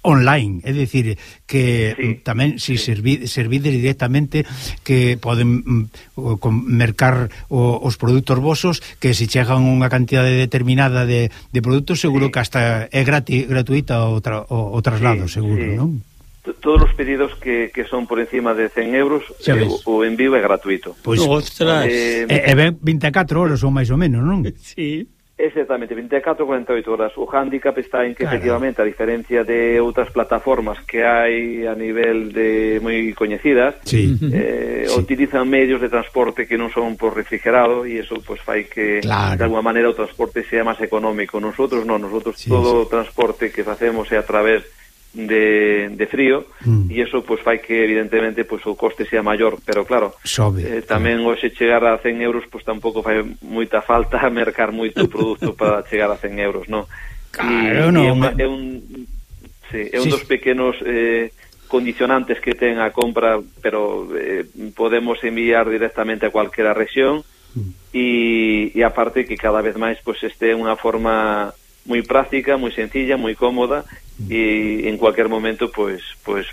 online, é dicir, que sí, tamén si sí. servi, servides directamente, que poden mm, mercar o, os produtos vosos, que se chegan unha cantidade determinada de, de produtos, seguro sí. que hasta é grati, gratuita o, tra, o, o traslado, sí, seguro, sí. non? Todos os pedidos que, que son por encima de cen euros, eh, o, o envío é gratuito. Pois, ostras, eh, e, e ben vinte e catro horas ou máis ou menos, non? Sí. Exactamente, vinte e catro a cuarenta e oito horas. O hándicap está en que, claro, efectivamente, a diferencia de outras plataformas que hai a nivel de moi coñecidas, sí. eh, sí. utilizan medios de transporte que non son por refrigerado, e eso pues fai que, claro, de alguma maneira o transporte sea máis económico. Nosotros non, nosotros sí, todo sí. o transporte que facemos é a través de, de frío mm. e iso pois fai que evidentemente pois o coste sea maior, pero claro, Sobe, eh, tamén claro. Hoxe chegar a cen euros pois tampouco fai moita falta mercar moito produto para chegar a cen euros, non? Claro, e, no, e é, uma, é un sí, é un sí. dos pequenos eh, condicionantes que ten a compra, pero eh, podemos enviar directamente a cualquiera rexión mm. e, e aparte que cada vez máis pois este é unha forma moi práctica, moi sencilla, moi cómoda e en cualquier momento pois pois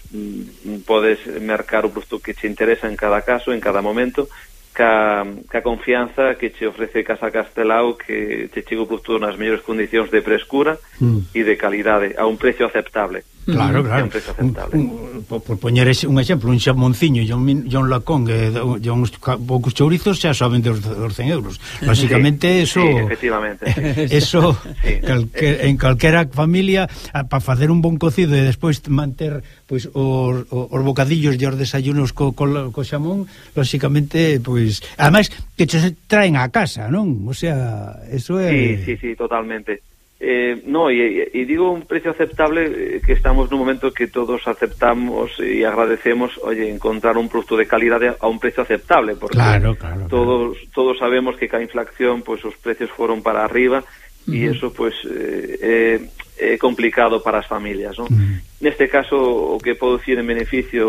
podes mercar o produto que te interesa en cada caso, en cada momento, ca, ca confianza que te ofrece Casa Castelao, que te chega o produto nas mellores condicións de frescura mm. e de calidade a un precio aceptable. Claro, claro. Un precio aceptable. Un, un, por, por poñer un exemplo, un xamonciño e un, un lacón e uns poucos chourizos xa soben dos, dos cen euros. Lógicamente, sí, eso... Sí, efectivamente. Eso, sí. calque, en calquera familia, para facer un bon cocido e despois manter pois os, os bocadillos e os desayunos co, co, co xamón, lógicamente, pois... Ademais, que se traen a casa, non? O sea, eso é... Sí, sí, sí, totalmente. Eh, no, y, y digo un precio aceptable, eh, que estamos nun momento que todos aceptamos y agradecemos, oye, encontrar un producto de calidad a un precio aceptable, porque claro, claro, todos claro. todos sabemos que ca inflación, pues os precios fueron para arriba uh-huh. y eso pues é eh, eh, complicado para as familias, ¿no? Uh-huh. Neste caso, o que podo dicir en beneficio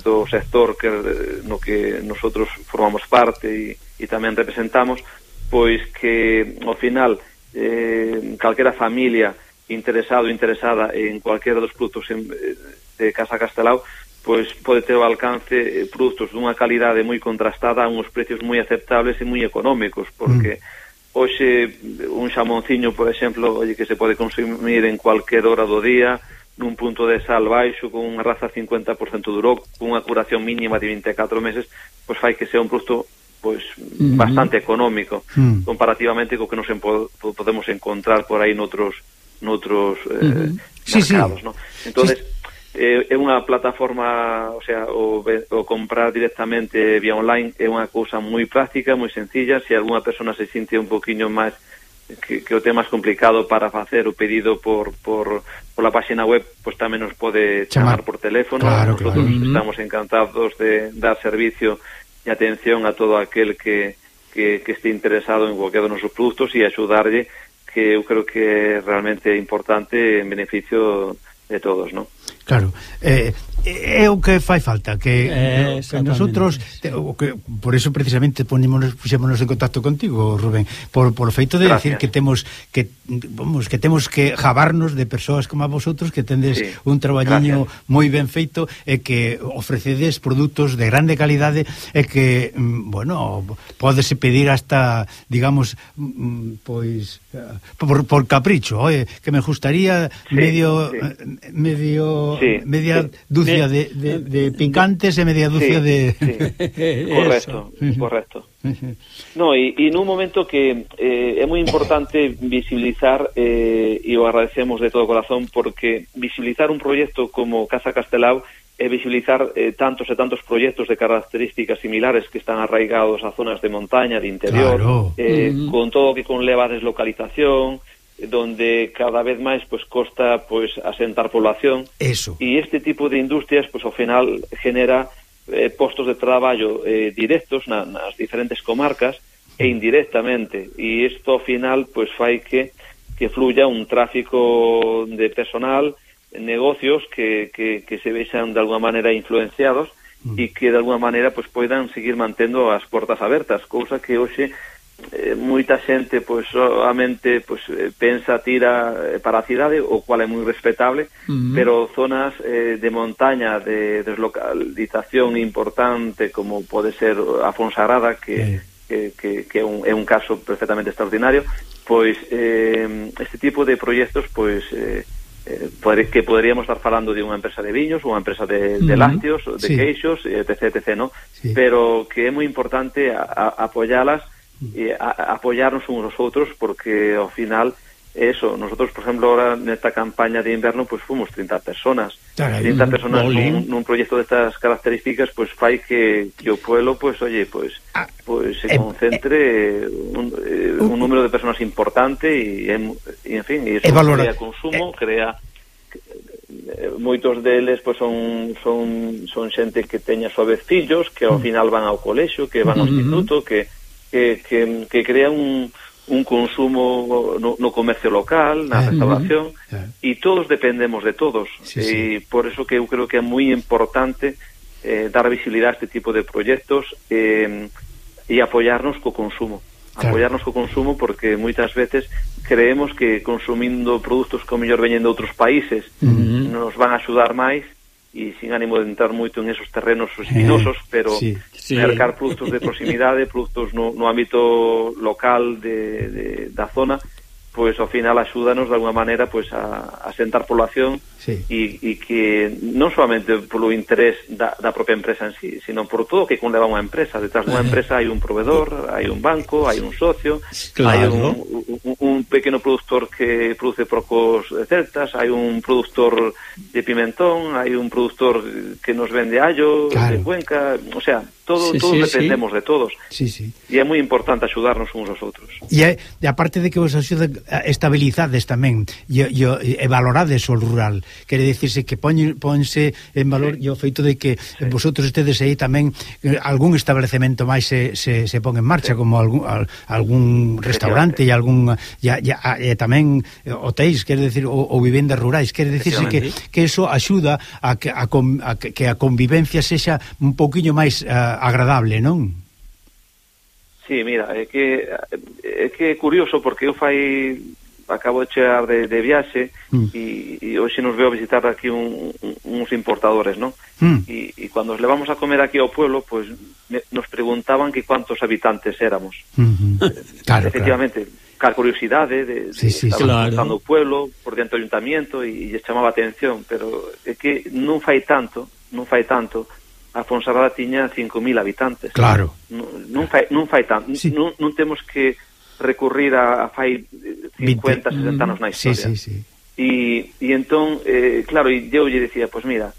do sector que no que nosotros formamos parte e, e tamén representamos, pois que ao final Eh, calquera familia interesado ou interesada en cualquiera dos produtos en, de Casa Castelao pois pode ter ao alcance eh, produtos dunha calidade moi contrastada a uns precios moi aceptables e moi económicos, porque mm. hoxe un xamonciño, por exemplo, oye, que se pode consumir en cualquier hora do día nun punto de sal baixo, con unha raza cincuenta por ciento duro, con unha curación mínima de vinte e catro meses, pois fai que sea un produto pois mm-hmm. bastante económico mm. comparativamente co que nos en po podemos encontrar por aí noutros noutros eh, mm-hmm. sí, mercados, sí. ¿no? Entonces sí. eh, é unha plataforma, o sea, o, o comprar directamente vía online é unha cousa moi práctica, moi sencilla. Se alguna persona se sinte un poquinho máis que, que o tema é complicado para facer o pedido por, por, por la página web, pois pues tamén nos pode chamar, chamar por teléfono. Claro, nosotros claro. estamos encantados de dar servicio e atención a todo aquel que, que, que esté interesado en cualquiera de nosos produtos e axudarlle, que eu creo que é realmente importante en beneficio de todos, ¿no? Claro, eh, é o que fai falta, que, eh, que nosotros te, o que, por eso precisamente ponémonos, puxémonos en contacto contigo, Rubén, por, por o feito de decir que temos que vamos, que temos que jabarnos de persoas como a vosotros, que tendes sí. un traballiño moi ben feito e que ofrecedes produtos de grande calidade e que, bueno, pódese pedir hasta, digamos, pois por, por capricho, oye, que me gustaría sí, medio sí. medio sí, media sí. dúcia de, de, de picantes e media dúcia sí, de... Sí. Correcto, correcto. No, e, e nun momento que eh, é moi importante visibilizar, eh, e o agradecemos de todo corazón, porque visibilizar un proxecto como Casa Castelao é visibilizar eh, tantos e tantos proxectos de características similares que están arraigados a zonas de montaña, de interior, claro. eh, uh-huh. con todo o que conleva a deslocalización, donde cada vez máis pues costa pues asentar población. Eso. E este tipo de industrias pues ao final genera eh, postos de traballo eh, directos na, nas diferentes comarcas e indirectamente, e isto ao final pues fai que que fluya un tráfico de personal, negocios que, que, que se vexan de alguna maneira influenciados mm. e que de alguna maneira pues poidan seguir mantendo as portas abertas, cousa que hoxe Eh, moita xente pois solamente pois pensa tira para a cidade, o cual é moi respetable, uh-huh. pero zonas eh, de montaña, de deslocalización importante, como pode ser a Fonsagrada, que, uh-huh. que, que, que é, un, é un caso perfectamente extraordinario, pois eh, este tipo de proxectos pois eh, eh, que poderíamos estar falando de unha empresa de viños, unha empresa de, de lácteos, de sí. queixos, etc, etc, ¿no? Sí. Pero que é moi importante a, a, apoyalas e a, a apoyarnos uns aos outros, porque ao final eso, nosotros por exemplo ahora nesta campaña de inverno pues fomos trinta personas, Caray, trinta personas nun, nun proxecto destas características, pues fai que, que o pueblo pues oye, pues ah, pues se eh, concentre eh, un, eh, uh, un número de personas importante e, en fin, e eso crea consumo, eh, crea moitos deles pois son son son xente que teña a súa vez fillos, que ao final van ao colexio, que van ao instituto, que que que, que crean un un consumo no, no comercio local, na restauración, e todos dependemos de todos. Sí, sí. E por eso que eu creo que é moi importante eh, dar visibilidade a este tipo de proxectos eh, e apoiarnos co consumo. Claro. Apoiarnos co consumo porque moitas veces creemos que consumindo produtos que ao mellor veñen de outros países uh-huh. nos van a axudar máis, e sin ánimo de entrar moito en esos terrenos espinosos, eh, pero sí, sí. mercar produtos de proximidade, produtos no, no ámbito local de, de, da zona, pois ao final axúdanos de alguma maneira pois a, a sentar población sí. e, e que non solamente polo interés da, da propia empresa en sí, sino por todo o que conleva unha empresa. Detrás dunha empresa hai un proveedor, hai un banco, hai un socio, claro. hai un, un, un pequeno productor que produce procos celtas, hai un productor de pimentón, hai un productor que nos vende allo, claro. de Cuenca, o sea, todo, sí, todos sí, dependemos sí. de todos. Sí, sí. E é moi importante axudarnos uns aos outros. E, é, e aparte de que vos axuda, estabilizades tamén e, e, e valorades o rural. Quere dicirse que poñe, ponse en valor sí. e o feito de que sí. vosotros estedes aí tamén eh, algún establecemento máis se, se, se pon en marcha, sí. como algún, al, algún restaurante e algún e, e, e tamén hotéis, quere dicir, ou, ou vivendas rurais. Quere dicirse que, que eso axuda a que a, a, que a convivencia sexa un pouquiño máis uh, agradable, non? Sí, mira, é que é que é curioso porque eu fai acabo de chegar de, de viaxe mm. e, e hoxe nos veo a visitar aquí un, un, uns importadores, non? Mm. E, e cando os levamos a comer aquí ao pueblo, pues me, nos preguntaban que cuántos habitantes éramos. Mm-hmm. eh, claro, efectivamente, claro. Ca curiosidade de, de sí, sí, estar claro. o pueblo por dentro do ayuntamiento e, e chamaba a atención, pero é que non fai tanto, non fai tanto. A Fonsagrada tiña cinco mil habitantes. Claro. Non, non fai non fai tanto, sí. non, non temos que recurrir a, a fai cincuenta, sesenta anos na historia. Sí, sí, sí. E, e entón, eh, claro, e eu lle decía, pois pues mira,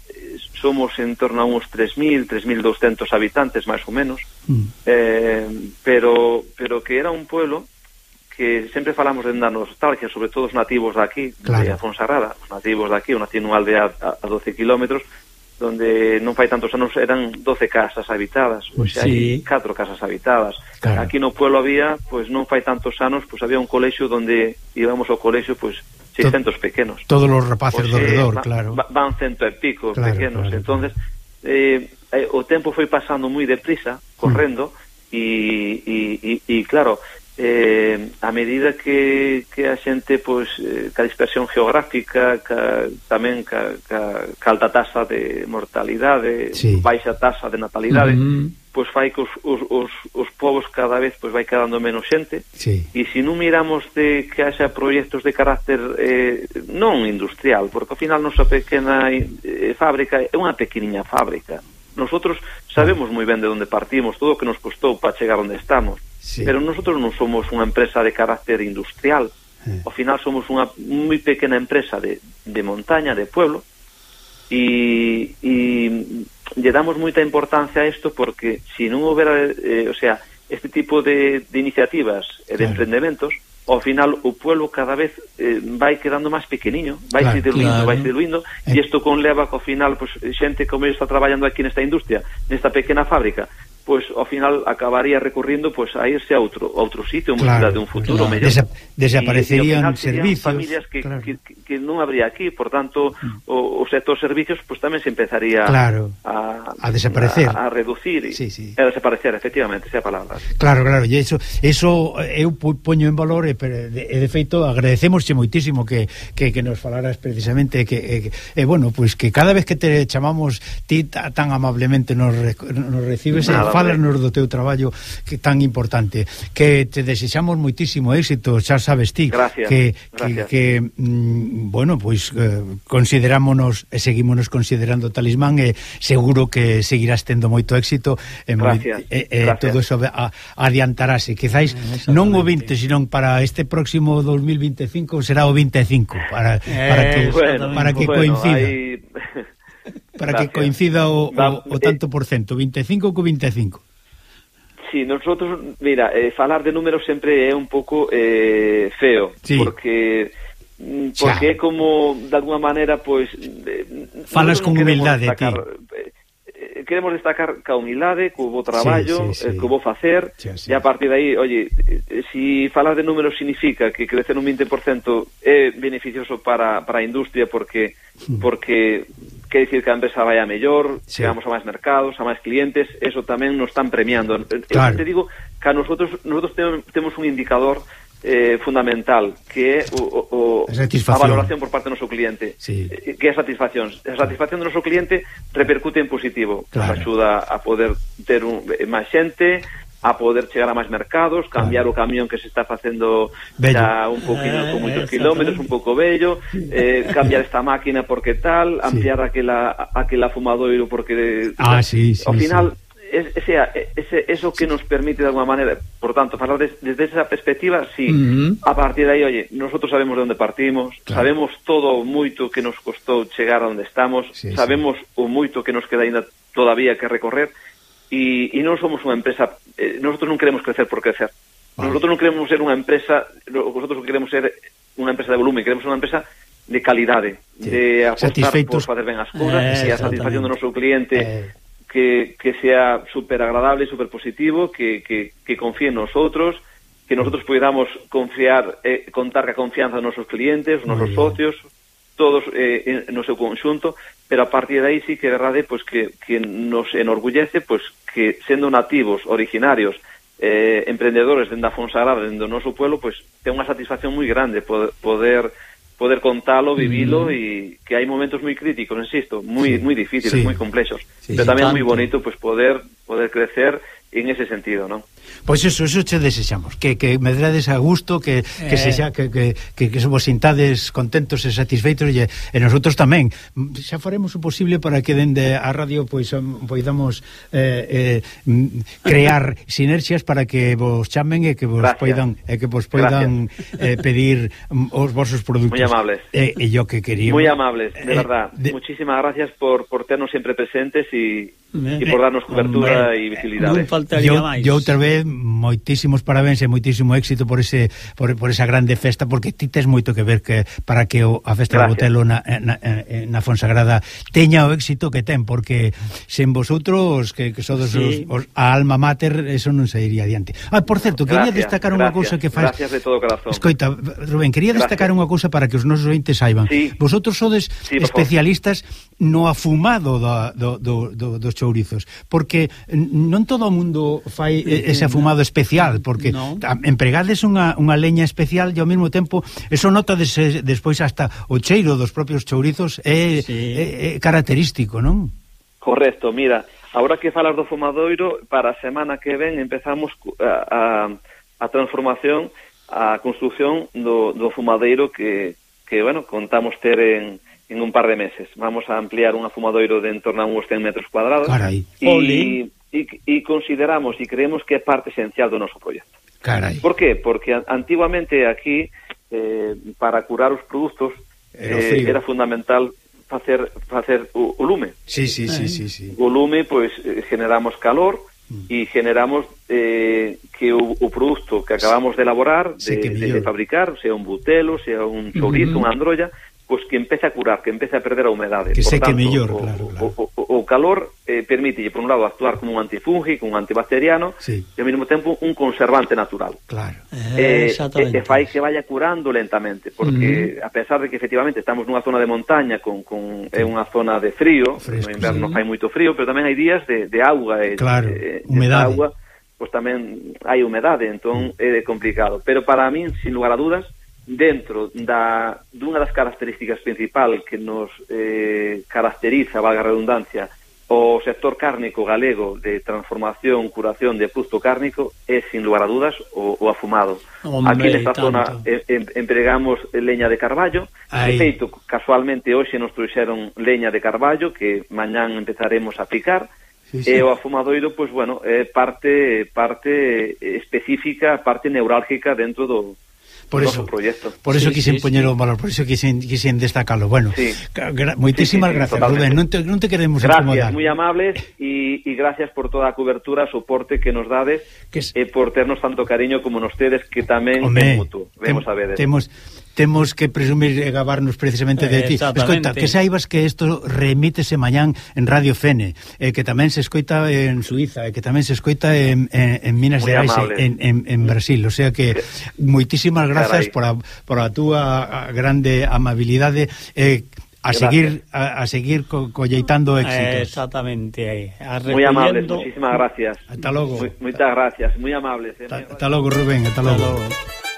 somos en torno a uns tres mil, tres mil doscientos habitantes, máis ou menos, mm. eh, pero pero que era un pueblo que sempre falamos de da nostalgia, sobre todo os nativos de aquí, claro. de Fonsagrada, os nativos de aquí, eu nací nunha aldea a, a doce kilómetros, donde non fai tantos anos eran doce casas habitadas, pois sí. hai catro casas habitadas. Claro. Aquí no pueblo había, pois non fai tantos anos, pois había un colexio donde íbamos ao colexio, pois seiscentos pequenos. Todos os rapaces pois, do redor, eh, claro. Van cento e pico claro, pequenos. Claro, entonces eh, eh, o tempo foi pasando moi deprisa, correndo, e, e, e, e claro, eh, a medida que, que a xente pois, eh, ca dispersión geográfica ca, tamén ca, ca, ca alta tasa de mortalidade, sí. baixa tasa de natalidade, uh-huh. pois fai que os, os, os, os povos cada vez pois vai quedando menos xente, sí. e se non miramos de que haxa proxectos de carácter eh, non industrial, porque ao final nosa pequena eh, fábrica é unha pequeniña fábrica. Nosotros sabemos moi ben de onde partimos, todo o que nos costou para chegar onde estamos. Sí. Pero nosotros non somos unha empresa de carácter industrial. Eh. Ao final somos unha moi pequena empresa de, de montaña, de pueblo, e, e lle damos moita importancia a isto porque se non houbera, eh, o sea, este tipo de, de iniciativas e de claro. emprendementos, ao final o pueblo cada vez eh, vai quedando máis pequeniño, vai claro, se diluindo, claro. vai se diluindo, e eh. isto conleva que ao final pues, xente como está traballando aquí nesta industria, nesta pequena fábrica, pois ao final acabaría recurrindo pois a irse a outro outro sitio, claro, de un futuro claro. mellor. Desa desaparecerían servicios, familias que, claro. que, que, que non habría aquí, por tanto, mm. o, o sector servicios pois tamén se empezaría claro. a, a desaparecer, a, a reducir e sí, sí. a desaparecer, efectivamente, esa palabra. Claro, claro, e eso, eso eu poño en valor e de, de feito agradecemosche moitísimo que, que, que nos falaras precisamente que, que eh, bueno, pois pues que cada vez que te chamamos ti tan amablemente nos, nos recibes e fálanos do teu traballo que tan importante, que te desexamos moitísimo éxito, xa sabes ti gracias, que, gracias. que, que mm, bueno, pois pues, eh, considerámonos e seguímonos considerando Talismán e seguro que seguirás tendo moito éxito e, gracias, e, e gracias. todo eso a, adiantarase, quizáis eh, non o vinte, senón para este próximo dos mil veinticinco será o vinte e cinco para, para que, eh, bueno, para que bueno, coincida hay... para gracias. Que coincida o, o, o tanto por cento, vinte e cinco co vinte e cinco. Sí, nosotros, mira, eh, falar de números sempre é un pouco eh, feo, sí. porque porque é como, de alguna maneira, pois... Falas con humildade, ti. Queremos destacar ca humildade, co bo traballo, sí, sí, sí. co bo facer, sí, sí. E a partir de aí, oye, si falar de números significa que crecer un vinte por cento é beneficioso para, para a industria porque porque quer dicir que a empresa vai a mellor, sí. Chegamos a máis mercados, a máis clientes, eso tamén nos están premiando. Claro. Eu te digo que a nosotros, nosotros temos un indicador Eh, fundamental, que é o, o, a valoración por parte do noso cliente, sí. eh, que é a satisfacción. A satisfacción do noso cliente repercute en positivo, claro. Nos axuda a poder ter un, máis xente, a poder chegar a máis mercados, cambiar claro. O camión que se está facendo xa un poquinho, con moitos kilómetros, un pouco bello, eh, cambiar esta máquina porque tal, ampliar sí. aquela, aquela fumadoiro porque ah, sí, sí, ao final sí. Ese, ese, eso que nos permite de alguna manera, por tanto, falar des, desde esa perspectiva, sí, uh-huh. A partir de aí, oye, nosotros sabemos de onde partimos, claro. Sabemos todo o moito que nos costou chegar a onde estamos, sí, sabemos sí. O moito que nos queda ainda todavía que recorrer, e, e non somos unha empresa, eh, nosotros non queremos crecer por crecer, vale. Nosotros non queremos ser unha empresa, nosotros queremos ser unha empresa de volumen, queremos ser unha empresa de calidade, sí. De apostar por fazer ben as cousas, eh, e a satisfacción do noso cliente, eh. Que, que sea super agradable, super positivo, que, que, que confíe en nosotros, que nosotros podamos confiar, eh, contar ca confianza dos nosos clientes, os nosos socios, todos eh, no seu conxunto, pero a partir de aí sí que é verdade pues, que, que nos enorgullece pues, que sendo nativos, originarios, eh, emprendedores dende a Fonsagrada, dende o noso pueblo, pues, ten unha satisfacción moi grande poder... poder poder contalo, vivilo e mm. que hai momentos moi críticos, insisto, moi sí. moi difíciles, sí. moi complexos, sí, pero tamén moi bonito pues poder poder crecer en ese sentido, ¿no? Pois eso, eso che desexamos, que, que medrades a gusto, que, que, eh. se xa, que, que, que, que vos sintades contentos e satisfeitos e, e nosotros tamén. Xa faremos o posible para que dende a radio pois poidamos eh, eh, crear sinerxias para que vos chamen e que vos Gracias. poidan e que vos poidan eh, pedir os vosos produtos. Moi amables. E eh, yo que quería. Moi amables, de eh, verdad. De... Muchísimas gracias por, por ternos sempre presentes e e por darnos cobertura e visibilidade. Faltaría máis. Eu outra vez moitísimos parabéns e moitísimo éxito por ese por, por esa grande festa, porque ti tes moito que ver que para que o, a festa do Botelo na, na, na Fonsagrada teña o éxito que ten, porque sen vosotros que, que sodes sí. os, os, a alma mater, eso non se iría adiante. Ah, por certo, quería gracias, destacar unha cousa que faz. Gracias de todo corazón. Escoita, Rubén, quería gracias. destacar unha cousa para que os nosos ointes saiban. Sí. Vosotros sodes sí, especialistas no afumado do, do, do, dos chourizos, porque non todo o mundo fai ese afumado especial, porque no. empregades unha, unha leña especial e ao mesmo tempo eso nota des, despois hasta o cheiro dos propios chourizos é, sí. é, é característico, non? Correcto, mira, agora que falas do fumadoiro, para a semana que ven empezamos a, a, a transformación, a construción do, do fumadeiro que, que, bueno, contamos ter en en un par de meses. Vamos a ampliar un fumadoiro de en torno a uns cen metros cuadrados. Carai. E, e, e consideramos e creemos que é parte esencial do noso proxecto. Carai. Por qué? Porque antiguamente aquí, eh, para curar os produtos, eh, era fundamental facer facer o, o lume. Sí, sí, sí, sí, sí. O lume, pois, pues, generamos calor e mm. generamos eh, que o, o produto que acabamos de elaborar, de, sí, de, de fabricar, sea un butelo, sea un chourizo, mm-hmm. unha androlla, pois que empece a curar, que empece a perder a humedade. Que por seque tanto, mellor, o, claro, claro. O, o, o calor eh, permite, por un lado, actuar como un antifúngico, un antibacteriano, sí. e ao mesmo tempo un conservante natural. Claro. Eh, e, e fai que vaya curando lentamente, porque mm. a pesar de que efectivamente estamos nunha zona de montaña, con, con é unha zona de frío, fresco, no inverno sí. fai moito frío, pero tamén hai días de, de auga, e, claro, e, humedade. Agua, pois tamén hai humedade, entón mm. é complicado. Pero para min, sin lugar a dudas, dentro da dunha das características principal que nos eh, caracteriza, valga a redundancia, o sector cárnico galego de transformación, curación de produto cárnico é, sin lugar a dudas, o, o afumado. Hombre, aquí nesta tanto. zona eh, em, empregamos leña de carballo. De feito, casualmente hoxe nos trouxeron leña de carballo que mañán empezaremos a picar. Sí, sí. E o afumadoiro, pois, bueno, é parte, parte específica, parte neurálgica dentro do Por eso, por eso sí, quixen sí, poñer o valor, por eso quixen, quixen destacalo. Bueno, sí. gra moitísimas sí, sí, gracias, totalmente. Rubén, non te, non te queremos gracias, incomodar. Gracias, moi amables, e, e gracias por toda a cobertura, soporte que nos dades, e por ternos tanto cariño como nos tedes, que tamén é mutuo, vemos a veces. Temos, temos que presumir e gabarnos precisamente de ti. Escoita, que saibas que isto remítese mañán en Radio Fene, e que tamén se escoita en Suiza, e que tamén se escoita en, en, en Minas Gerais, en, en, en Brasil. O sea que moitísimas grazas por a, por a túa grande amabilidade e a seguir a, a seguir co, colleitando éxitos. Exactamente. Muy amables, muchísimas gracias. Hasta logo. Muy, muchas gracias, muy amables. Eh, hasta logo, Rubén, hasta logo. Hasta logo.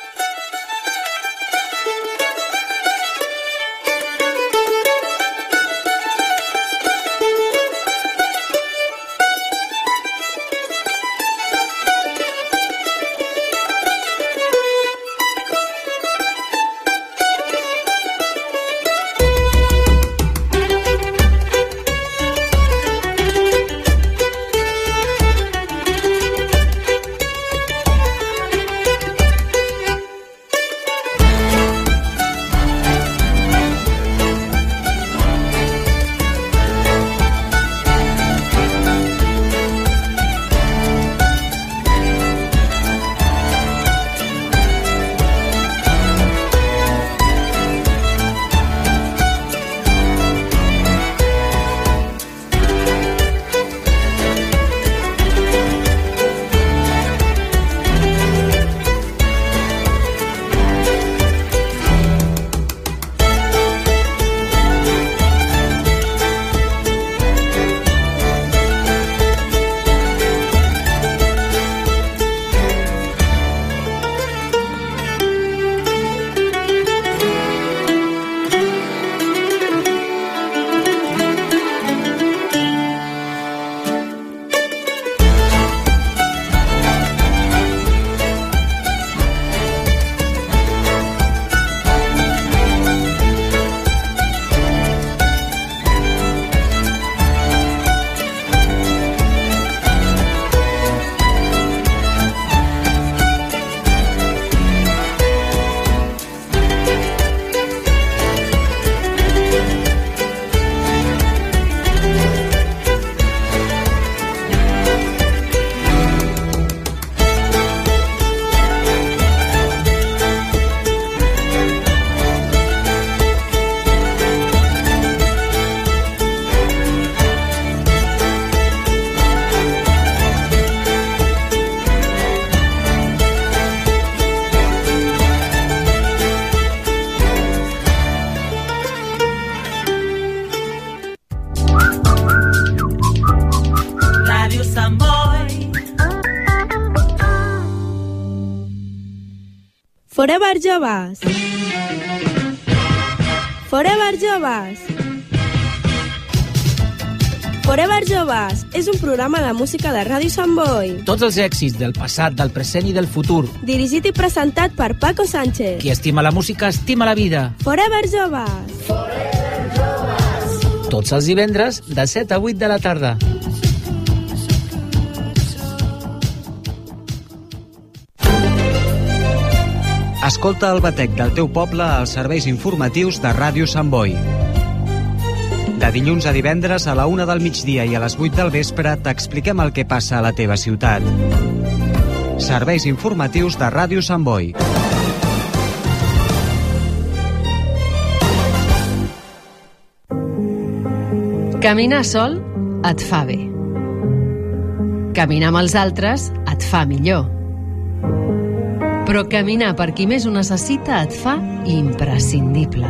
Forever Joves. Forever Joves. Forever Joves és un programa de música de Ràdio Sant Boi. Tots els èxits del passat, del present i del futur. Dirigit i presentat per Paco Sánchez. Qui estima la música, estima la vida. Forever Joves. Forever Joves. Tots els divendres, de set a vuit de la tarda. Escolta el batec del teu poble als serveis informatius de Ràdio Sant Boi. De dilluns a divendres a la una del migdia i a les vuit del vespre t'expliquem el que passa a la teva ciutat. Serveis informatius de Ràdio Sant Boi. Caminar sol et fa bé. Caminar amb els altres et fa millor. Però caminar per qui més ho necessita et fa imprescindible.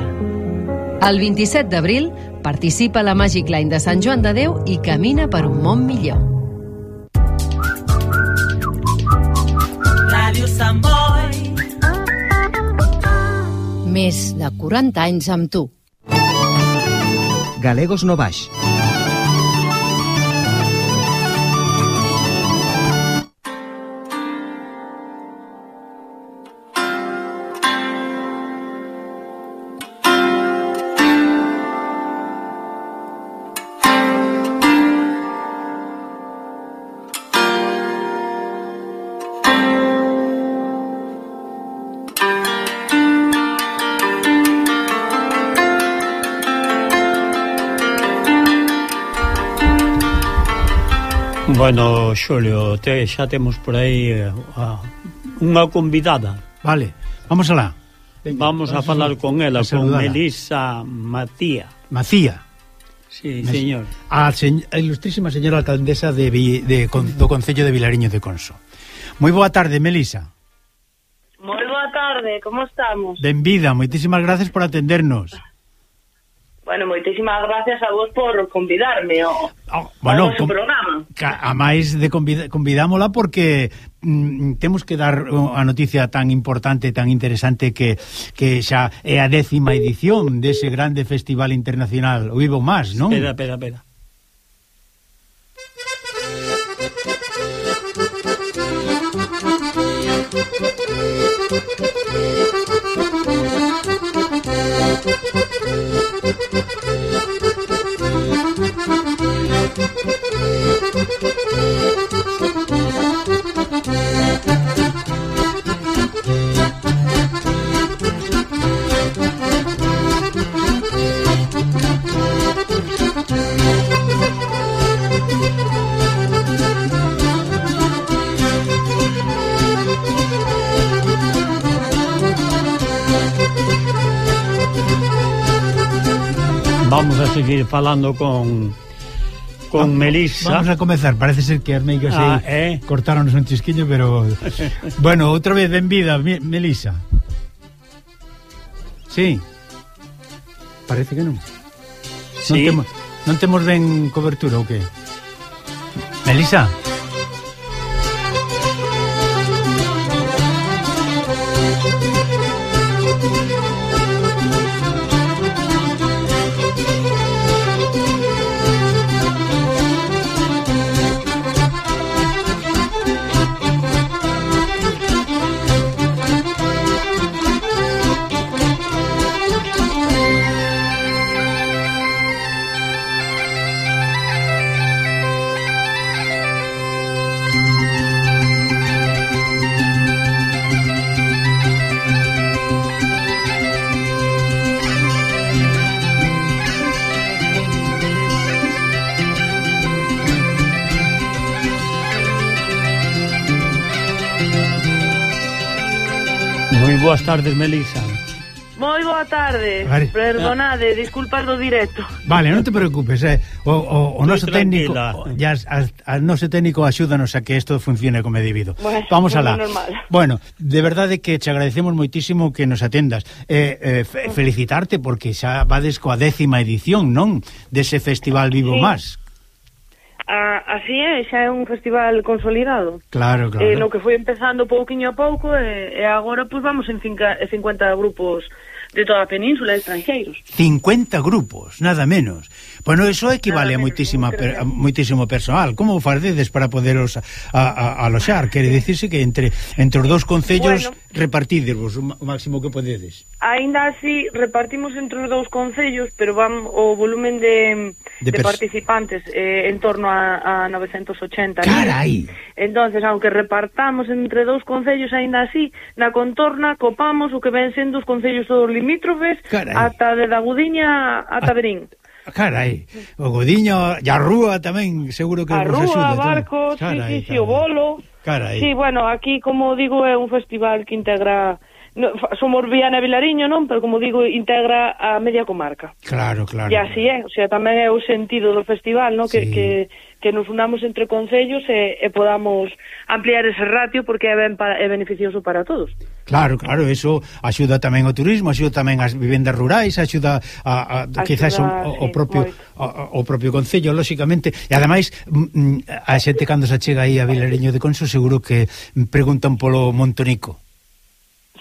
El vint-i-set d'abril participa a la Magic Line de Sant Joan de Déu i camina per un món millor. Ràdio Sant Boi. Més de quaranta anys amb tu. Galegos no baix. Bueno, Xulio, xa temos por aí uh, unha convidada. Vale, vamos alá. Vamos a falar con ela, con Melisa Macía. Macía. Sí, señor. A, se, a ilustrísima señora alcaldesa de, de, de, do Concello de Vilariño de Conso. Moi boa tarde, Melisa. Moi boa tarde, como estamos? Benvida, moitísimas gracias por atendernos. Bueno, moitísimas gracias a vos por convidarme ao, oh, bueno, ao programa. A máis de convid convidámola porque mm, temos que dar a noticia tan importante, tan interesante que, que xa é a décima edición dese grande festival internacional O Vivo Más, non? Espera, espera, espera. Vamos a seguir falando con con vamos, Melisa. Vamos a comezar, parece ser que as meigas ah, eh? cortaronos un chisquiño, pero bueno, outra vez benvida, Melisa. Sí. Parece que non. Sí. Non temos, non temos ben cobertura ou que? Melisa. Moi boas tardes, Melisa. Moi boa tarde. Vale. Perdonade, disculpas do directo. Vale, non te preocupes, eh. O, o, o noso técnico, ya a noso técnico axúdanos a que isto funcione como é debido. Bueno, vamos alá. Normal. Bueno, de verdade que te agradecemos moitísimo que nos atendas. Eh, eh, felicitarte porque xa vades coa décima edición, non? Dese Festival Vivo sí. Más. Ah, así é, xa é un festival consolidado. Claro, claro. Eh, no que foi empezando pouquiño a pouco e, e agora pois vamos en cincuenta grupos de toda a península, estranxeiros. cincuenta grupos, nada menos. Bueno, eso equivale a moitísima per, a moitísimo personal. Como facedes para poderos a, a, a aloxar? Quere dicirse que entre entre os dous concellos bueno, repartidevos o máximo que podedes. Aínda así repartimos entre os dous concellos, pero van o volumen de, de, de participantes eh, en torno a, a novecentos ochenta. Carai! Entonces, aunque repartamos entre dous concellos, aínda así, na contorna copamos o que ven sendo os concellos todos limítrofes, carai, ata de da Gudiña a Taberín. Carai, o Godiño e a Rúa tamén, seguro que a vos Rúa, axuda. a Barco, carai, sí, sí, sí, o Bolo. Carai. Sí, bueno, aquí, como digo, é un festival que integra... No, somos Viana e Vilariño, non? Pero, como digo, integra a media comarca. Claro, claro. E así é, o sea, tamén é o sentido do festival, non? Que, sí. que, que nos unamos entre concellos e, e podamos ampliar ese ratio porque é, ben para, é beneficioso para todos. Claro, claro, eso axuda tamén ao turismo, axuda tamén ás vivendas rurais, axuda a, a, a quizás o, o, propio, o, o propio concello, lóxicamente, e ademais a xente cando se chega aí a Vilariño de Conso seguro que preguntan polo Montonico.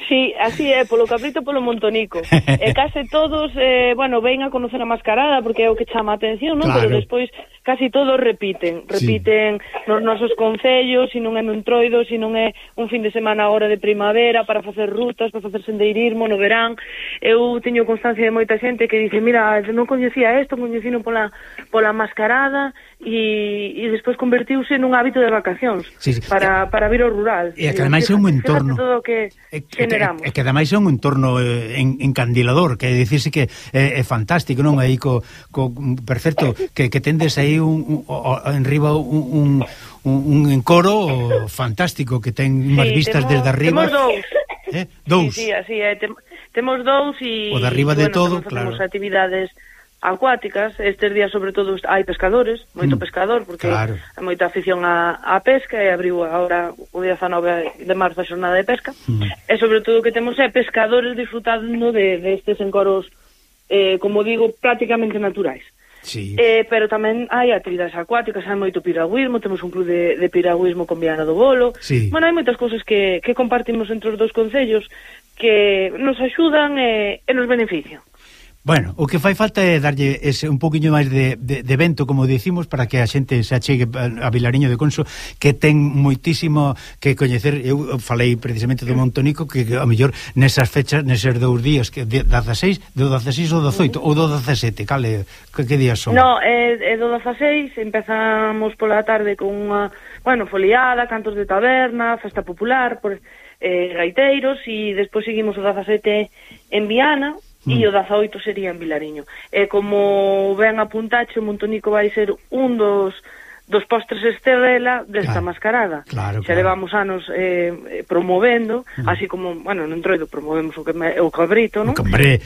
Sí, así é, polo Cabrito, polo Montonico. E case todos, eh, bueno, ven a conocer a mascarada porque é o que chama a atención, non? Claro. Pero despois casi todos repiten, repiten sí. nos nosos concellos, se non é no Entroido, se non é un fin de semana a hora de primavera para facer rutas, para facer sendeirismo no verán. Eu teño constancia de moita xente que dice, mira, non coñecía isto, coñecino pola, pola mascarada e, e despois convertiuse nun hábito de vacacións sí, sí. para, para vir ao rural. E que ademais é un entorno todo que e que, e que ademais é un entorno eh, en, encandilador, que dicirse que é, é fantástico, non? Aí co, co perfecto, que, que tendes aí un, un, o, enriba un, un, un encoro fantástico que ten unhas sí, vistas temos, desde arriba. Temos dous. Eh? Dous. Sí, sí, así é. Tem, temos dous e... O de arriba de bueno, todo, facemos claro. actividades acuáticas. Estes días, sobre todo, hai pescadores, moito Mm, pescador, porque claro. hai moita afición á, á pesca, e abriu agora o dezanove de marzo a xornada de pesca. Mm. E sobre todo o que temos é pescadores disfrutando de, de estes encoros, eh, como digo, prácticamente naturais. Sí. Eh, pero tamén hai actividades acuáticas, hai moito piragüismo, temos un club de, de piragüismo con Viana do Bolo. Sí. Bueno, hai moitas cousas que, que compartimos entre os dous concellos que nos axudan e, e nos benefician. Bueno, o que fai falta é darlle ese un poquinho máis de, de, de vento, como dicimos, para que a xente se achegue a Vilariño de Conso, que ten moitísimo que coñecer. Eu falei precisamente do Montonico, que, que a mellor nesas fechas, neses dous días, que de dezaseis, do dezaseis ou dezoito, ou do dezasete, cale, que, que días son? No, é, é do dezaseis, empezamos pola tarde con unha, bueno, foliada, cantos de taberna, festa popular, por, eh, gaiteiros, e despois seguimos o dezasete en Viana, e o dezaoito sería en Vilariño. E como ben apuntache, o Montonico vai ser un dos dos postres estrela desta claro, mascarada. Claro, Xa claro. levamos anos eh, promovendo, uh -huh. así como, bueno, no Entroido promovemos o, que me, o cabrito, non?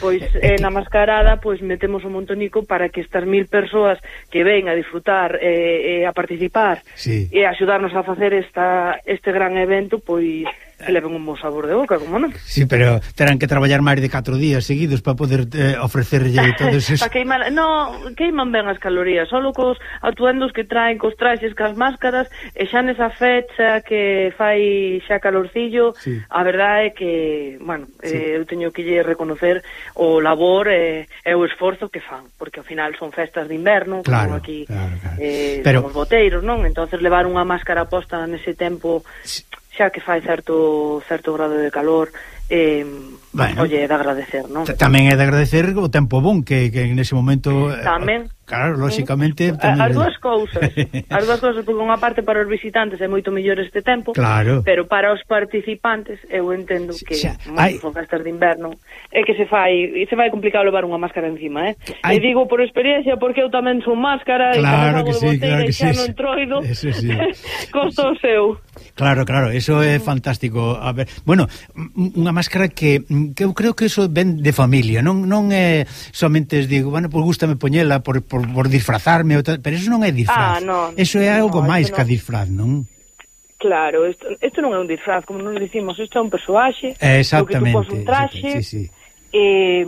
Pois eh, na mascarada pois metemos o Montonico para que estas mil persoas que ven a disfrutar e eh, eh, a participar sí. e axudarnos a facer esta este gran evento, pois que leven un bo sabor de boca, como non? Sí, pero terán que traballar máis de catro días seguidos para poder eh, ofrecerlle todo eso. Pa queimar, no, queiman ben as calorías, solo cos atuendos que traen, cos traxes, cas máscaras, e xa nesa fecha que fai xa calorcillo, sí. A verdade é que, bueno, sí. eh, eu teño que lle reconocer o labor e eh, o esforzo que fan, porque ao final son festas de inverno, claro, como aquí claro, claro. Eh, pero... somos boteiros, non? Entonces levar unha máscara posta nese tempo... Sí. Xa que fai certo certo grado de calor, eh, bueno, oye, é de agradecer, non? Tamén é de agradecer o tempo bon que, que en ese momento... Tamén. Claro, lóxicamente... Mm. As dúas cousas, as dúas cousas, porque unha parte para os visitantes é moito mellor este tempo, claro. Pero para os participantes eu entendo que xa, hai... son festas de inverno, é que se fai e se vai complicado levar unha máscara encima, eh? Ai... E digo por experiencia, porque eu tamén son máscara, claro e que sí, claro que xa sí. non Entroido, eso sí. costa o seu. Claro, claro, eso é fantástico. A ver, bueno, unha máscara que, que eu creo que eso ven de familia, non non é somente digo, bueno, pues gústame poñela por, por, por disfrazarme, pero eso non é disfraz. Ah, no, eso é algo no, máis no. que a disfraz, non? Claro, isto, isto non é un disfraz, como nos dicimos, isto é un persoaxe, exactamente, o que tú pos un traxe, sí, sí. e...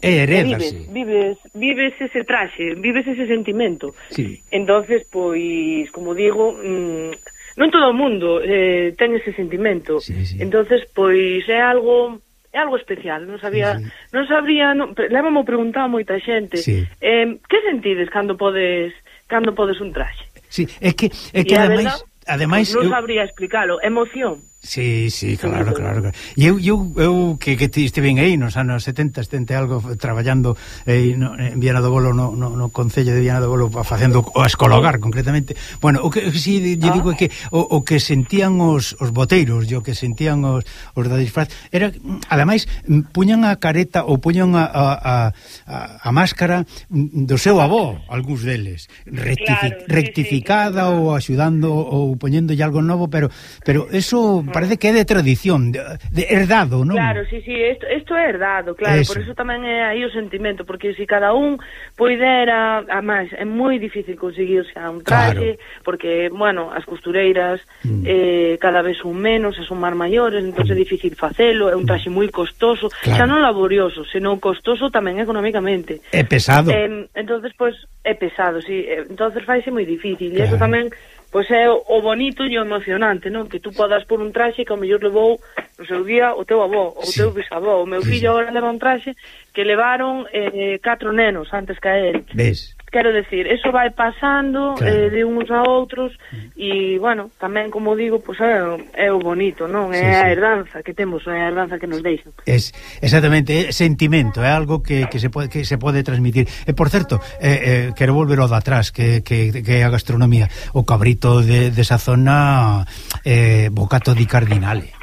E vives, heredase. vives, vives ese traxe, vives ese sentimento. Sí. Entonces, pois, como digo, mmm, non todo o mundo eh, ten ese sentimento. Sí, sí. Entonces, pois é algo é algo especial, non sabía, sí, sí. non sabría, non, levamos preguntado a moita xente. Sí. Eh, que sentides cando podes cando podes un traxe? Sí, é que é que ademais, ademais non eu... sabría explicarlo, emoción. Sí, sí, claro, claro, claro. E eu, eu, eu que, que estive aí nos anos setenta, setenta algo traballando eh, no, en Viana do Bolo, no, no, no Concello de Viana do Bolo, facendo o escologar concretamente. Bueno, o que si sí, lle digo é que o, o que sentían os, os boteiros, e o que sentían os, os da disfraz, era, ademais, puñan a careta ou puñan a, a, a, a máscara do seu avó, algúns deles, rectific, claro, sí, rectificada sí, sí, ou axudando ou poñéndolle algo novo, pero pero eso parece que é de tradición, de, de herdado, non? Claro, sí, sí, isto, isto é herdado, claro, eso. Por eso tamén é aí o sentimento, porque se cada un poidera, además, é moi difícil conseguirse a un traxe, claro. Porque, bueno, as costureiras mm. eh, cada vez son menos, son máis maiores, entón mm. é difícil facelo, é un traxe moi costoso, claro. Xa non laborioso, senón costoso tamén económicamente. É pesado. Eh, entonces, pois, pues, é pesado, sí, entonces faise moi difícil, claro. E eso tamén pois é o bonito e o emocionante, non? Que tú podas por un traxe que ao mellor levou no seu día o teu avó, o sí. teu bisavó. O meu fillo sí. Agora leva un traxe que levaron eh, catro nenos antes que a él. Ves? Quero decir, eso vai pasando, claro. eh, de uns a outros e, bueno, tamén, como digo, pois é, é o bonito, non? É sí, a herdanza que temos, é a herdanza que nos deixan. Es, exactamente, é sentimento, é algo que, que, se pode, que se pode transmitir. E, por certo, eh, eh, quero volver ao de atrás, que, que, que é a gastronomía. O cabrito de, de esa zona, eh, bocato di cardinale.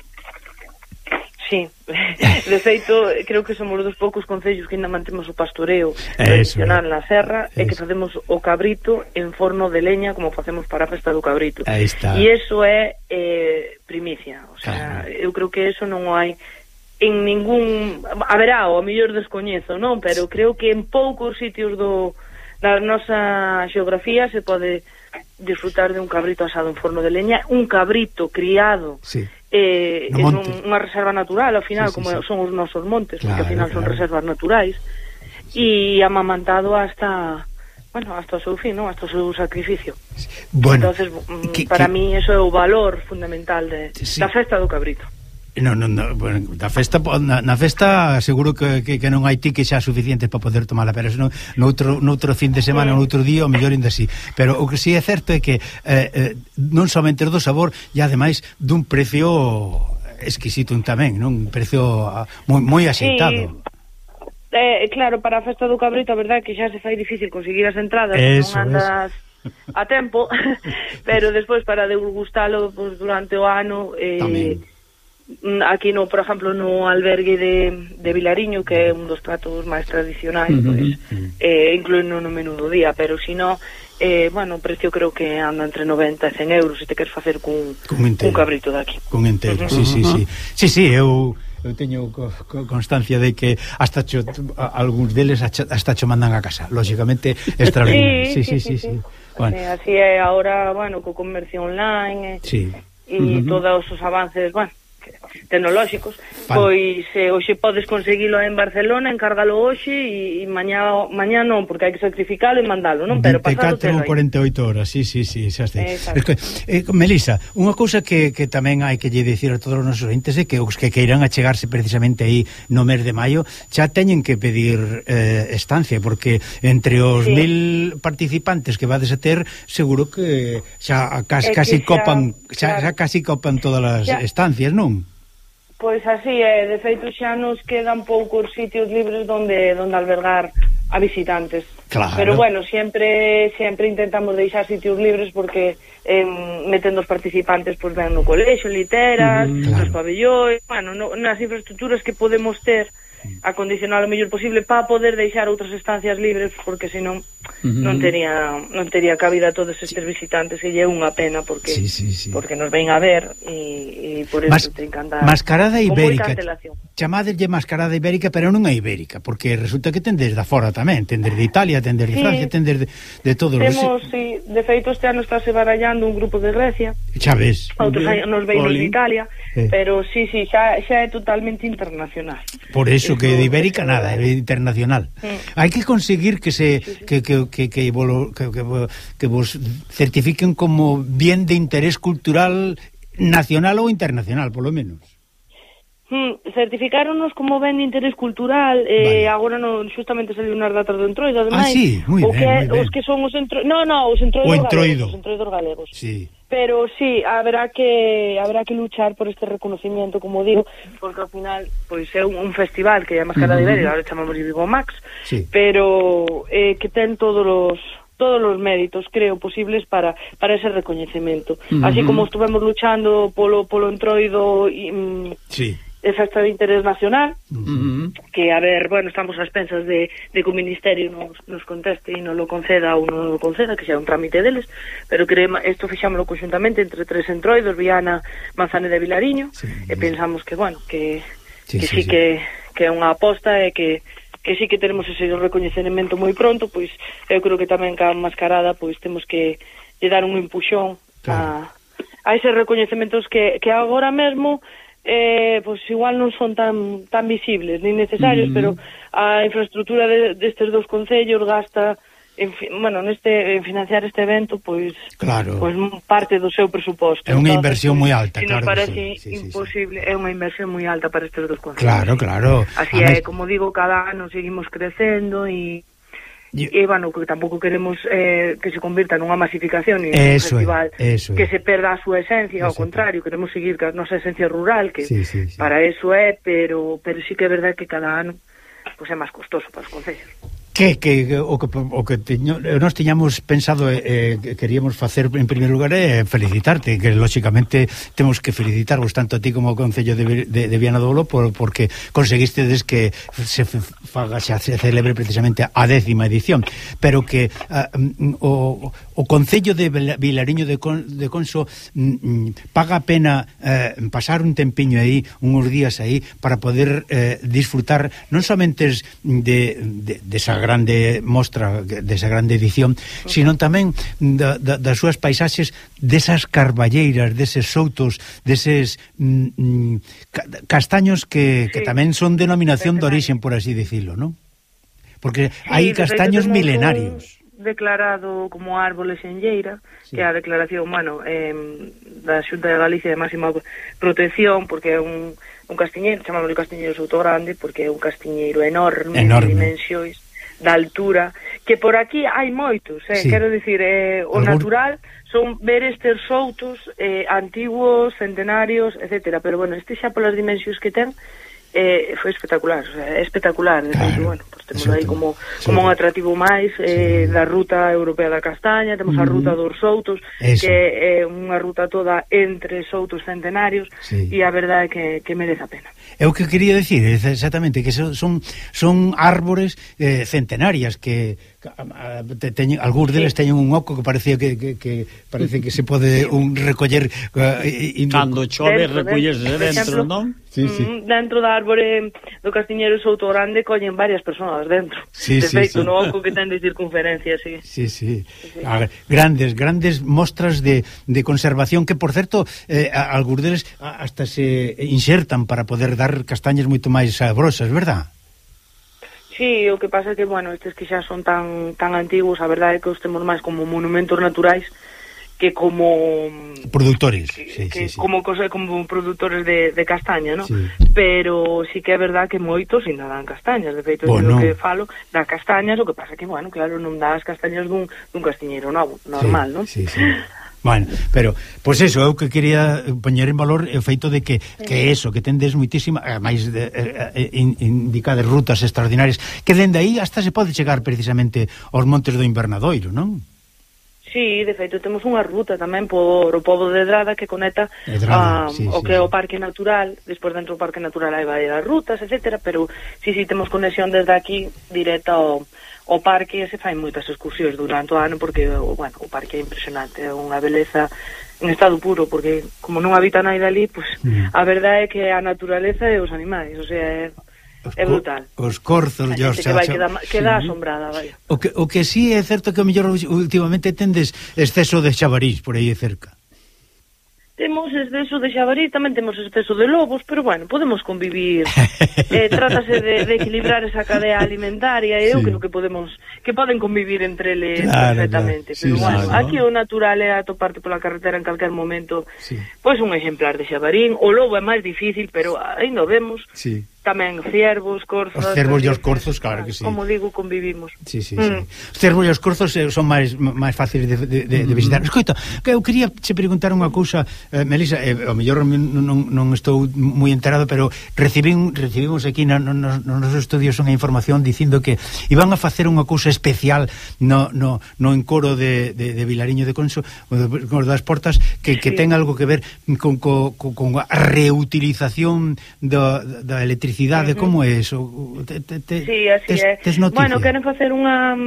Sí, de feito, creo que somos dos poucos concellos que ainda mantemos o pastoreo tradicional na serra e que facemos o cabrito en forno de leña como facemos para a festa do cabrito. E iso é eh, primicia, o sea, claro. Eu creo que eso non hai en ningún... Haberá, o a mellor descoñezo, non? Pero creo que en poucos sitios do da nosa xeografía se pode disfrutar de un cabrito asado en forno de leña, un cabrito criado sí. eh, no en un, unha reserva natural, ao final, sí, sí, como sí. son os nosos montes, claro, porque ao final claro. son reservas naturais, e amamantado hasta... Bueno, hasta o seu fin, non? Hasta o seu sacrificio. Bueno, entonces, que, para que... mí, eso é o valor fundamental de, sí. da festa do cabrito. No, no, no, bueno, da festa, na, na festa seguro que, que, que non hai ti que xa suficiente para poder tomala, pero no, no, outro, no outro fin de semana, no outro día, o mellor ainda así. Pero o que sí é certo é que eh, eh, non somente do sabor, e ademais dun precio exquisito tamén, non? Un precio moi, moi axeitado. Sí. Eh, claro, para a festa do cabrito a verdade é que xa se fai difícil conseguir as entradas, eso, non andas eso. a tempo pero despois para degustalo pues, durante o ano eh, aquí no, por exemplo, no albergue de, de Vilariño, que é un dos pratos máis tradicionais, uh -huh. pues, eh, incluíno no menú do día, pero si no eh, bueno, o precio creo que anda entre noventa e cen euros se te queres facer cun, cun cabrito daqui cun entero, uh -huh. sí, sí, sí sí, sí, eu eu teño co, co constancia de que hasta cho, a, algúns deles hasta cho mandan a casa, lógicamente extraordinario. Sí, sí, sí, sí, sí. sí. Bueno. Eh, así é agora, bueno, co comercio online, eh, sí. e uh -huh. todos os avances, bueno, tecnolóxicos, vale. Pois eh, hoxe podes conseguilo en Barcelona, encárgalo hoxe e, e mañá, mañá non, porque hai que sacrificalo e mandalo, non? Pero pasado vinte e catro ou cuarenta e oito horas, sí, sí, sí, xa sei. Es que, eh, Melisa, unha cousa que, que tamén hai que lle dicir a todos os nosos ointes é que os que queiran achegarse precisamente aí no mes de maio xa teñen que pedir eh, estancia, porque entre os sí. mil participantes que vades a ter, seguro que xa casi, casi xa, copan xa, claro. xa casi copan todas as xa. estancias, non? Pois así é, de feito xa nos quedan poucos sitios libres donde donde albergar a visitantes. Claro. Pero bueno, sempre sempre intentamos deixar sitios libres porque eh, metendo os participantes pois ven no colexio, literas, mm, claro. nos pabellóns, bueno, no, nas infraestructuras que podemos ter acondicionar o mellor posible para poder deixar outras estancias libres, porque senón uh -huh. non tería non tería cabida a todos estes visitantes, e é unha pena porque sí, sí, sí. porque nos ven a ver e, e por eso Mas, ten que andar mascarada ibérica, chamadelle mascarada ibérica, pero non é ibérica, porque resulta que tendes da fora tamén, tendes de Italia, tendes de sí. Francia, tendes de, de todos os... Temos, sí, de feito este ano estáse barallando un grupo de Grecia, xa ves, outros nos veinos de Italia, eh. pero sí, sí, xa, xa é totalmente internacional. Por eso que de ibérica nada, é internacional. Sí. Hai que conseguir que se sí, sí. que que que que, volo, que que que vos certifiquen como bien de interés cultural nacional ou internacional, polo menos. Hmm, certificáronos como ben de interés cultural, eh, vale. Agora non justamente saliu unhas datas do entroido, ademais. Ah, sí, moi ben, que, moi ben. Os que son os entroidos, no, no, os entroidos galegos, os entroidos galegos. Sí. Pero sí, habrá que habrá que luchar por este reconocimiento, como digo, porque ao final pois é un, un festival que é a Mascarada uh -huh. Ibérica, agora chamamos Vigo Max, sí. pero eh, que ten todos os todos os méritos, creo, posibles para para ese recoñecemento. Uh -huh. Así como estuvemos luchando polo polo entroido e mm, sí. de festa de interés nacional, uh -huh. que, a ver, bueno, estamos ás pensas de, de que o Ministerio nos, nos conteste e non lo conceda ou non lo conceda, que sea un trámite deles, pero que isto fixámoslo conjuntamente entre tres entroidos, Viana, Manzaneda e Vilariño, sí, e pensamos que, bueno, que sí, que, sí, sí, sí. que, que é unha aposta e que que sí que tenemos ese recoñecemento moi pronto, pois eu creo que tamén ca Mascarada pois temos que lle dar un empuxón claro. a, a eses recoñecementos que, que agora mesmo eh, pues igual non son tan tan visibles ni necesarios, mm. pero a infraestructura de, destes dos concellos gasta en, bueno, neste, en financiar este evento pois claro. pois parte do seu presuposto. É unha inversión moi alta, si claro. Nos parece sí, sí, imposible, sí, sí. É unha inversión moi alta para estes dos concellos. Claro, claro. Así é, como digo, cada ano seguimos crecendo e E, e bueno, que tampouco queremos eh, que se convirta nunha masificación e un festival é, que é. se perda a súa esencia, ao contrario, queremos seguir ca nosa esencia rural, que sí, sí, sí. para eso é, pero pero sí que é verdade que cada ano pues, é máis costoso para os concellos. que, que o que, o que teño, nós tiñamos pensado eh, que queríamos facer en primeiro lugar é eh, felicitarte, que lógicamente temos que felicitarvos tanto a ti como ao Concello de, de, de Viana do Olo por, porque conseguistedes que se faga, se celebre precisamente a décima edición, pero que uh, o, o Concello de Vilariño de, Con, de Conso mm, paga a pena eh, pasar un tempiño aí, uns días aí, para poder eh, disfrutar non somente de, de, de esa grande mostra, desa grande edición, sino tamén da, da, das súas paisaxes, desas carballeiras, deses soutos, deses mm, castaños que, que sí, tamén son denominación de origen, por así decirlo, non? Porque sí, hai castaños milenarios declarado como árbol xenlleira, sí, que é a declaración, bueno, eh, da Xunta de Galicia de máxima protección, porque é un, un castiñeiro, chamamos de castiñeiro Souto Grande, porque é un castiñeiro enorme, enorme. de dimensións, da altura, que por aquí hai moitos, eh? Sí. Quero dicir, eh, o Algún... natural son ver estes soutos eh, antiguos, centenarios, etcétera, pero bueno, este xa polas dimensións que ten, eh, foi espectacular, o sea, é espectacular, claro. Entonces, bueno, pues temos aí como, como un atractivo máis eh, sí, da ruta europea da castaña, temos mm-hmm. a ruta dos soutos, eso, que é unha ruta toda entre soutos centenarios, sí, e a verdade é que, que merece a pena. É o que quería decir, exactamente, que son son árbores eh, centenarias que te, teñen, algúns deles sí, teñen un oco que parecía que, que, que parece que se pode un recoller uh, e, e cando chove recollese dentro, non? Sí, sí. Dentro da árbore do castiñeiro Souto Grande collen varias persoas dentro. Sí, de sí, feito, sí, no oco que ten de circunferencia, sí. Sí, sí. sí. A, grandes, grandes mostras de, de conservación que, por certo, eh, algúns deles hasta se insertan para poder dar castañas moito máis sabrosas, verdad? Sí, o que pasa é que, bueno, estes que xa son tan tan antigos, a verdade é que os temos máis como monumentos naturais que como productores, que, sí, que sí, sí. como cosa como productores de, de castaña, ¿no? Sí. Pero sí que é verdad que moitos ainda dan castañas, de feito, bueno, que falo da castañas, o que pasa que, bueno, claro, non dá as castañas dun, dun castiñeiro novo, normal, sí, non? Sí, sí. Bueno, pero, pois pues eso, eu que quería poñer en valor o feito de que, sí, que eso, que tendes moitísima, máis de, eh, indicadas rutas extraordinarias, que dende aí hasta se pode chegar precisamente aos montes do Invernadoiro, non? Sí, de feito, temos unha ruta tamén por o pobo de Edrada que conecta Edrada, a, sí, o sí, que é o Parque Natural, despois dentro do Parque Natural hai varias rutas, etcétera, pero sí, sí, temos conexión desde aquí directa ao, ao parque e se fai moitas excursións durante o ano porque, bueno, o parque é impresionante, é unha beleza en estado puro, porque como non habita nada ali, pues, mm. a verdade é que a naturaleza e os animais, o sea, é... é brutal. Os corzos, a xente que vai queda, queda sí, asombrada, vai. O que, o que sí é certo que o mellor últimamente tendes exceso de xabarís por aí cerca. Temos exceso de xabarís, tamén temos exceso de lobos, pero bueno, podemos convivir. eh, trátase de, de equilibrar esa cadea alimentaria, e eu sí, creo que podemos, que poden convivir entre eles claro, perfectamente. Claro. Pero sí, bueno, claro, aquí o natural é atoparte pola carretera en calquer momento, sí, pois un exemplar de xabarín. O lobo é máis difícil, pero ainda o vemos. Sí. Tamén ciervos, corzos... Os ciervos e os corzos, claro que sí. Como digo, convivimos. Sí, sí, mm. sí. Os ciervos e os corzos son máis máis fáciles de, de, de, de visitar. Mm. Escoita, que eu quería che preguntar unha cousa, eh, Melisa, eh, ao mellor non, non estou moi enterado, pero recibín, recibimos aquí no, no, no, nos nosos estudios unha información dicindo que iban a facer unha cousa especial no, no, no encoro de, de, de Vilariño de Conso, con das Portas, que, que sí, ten algo que ver con, con, con a reutilización do, da electricidade. Uh-huh. Como é eso? Te, te, te, sí, así tes, é. Tes bueno, queren facer unha...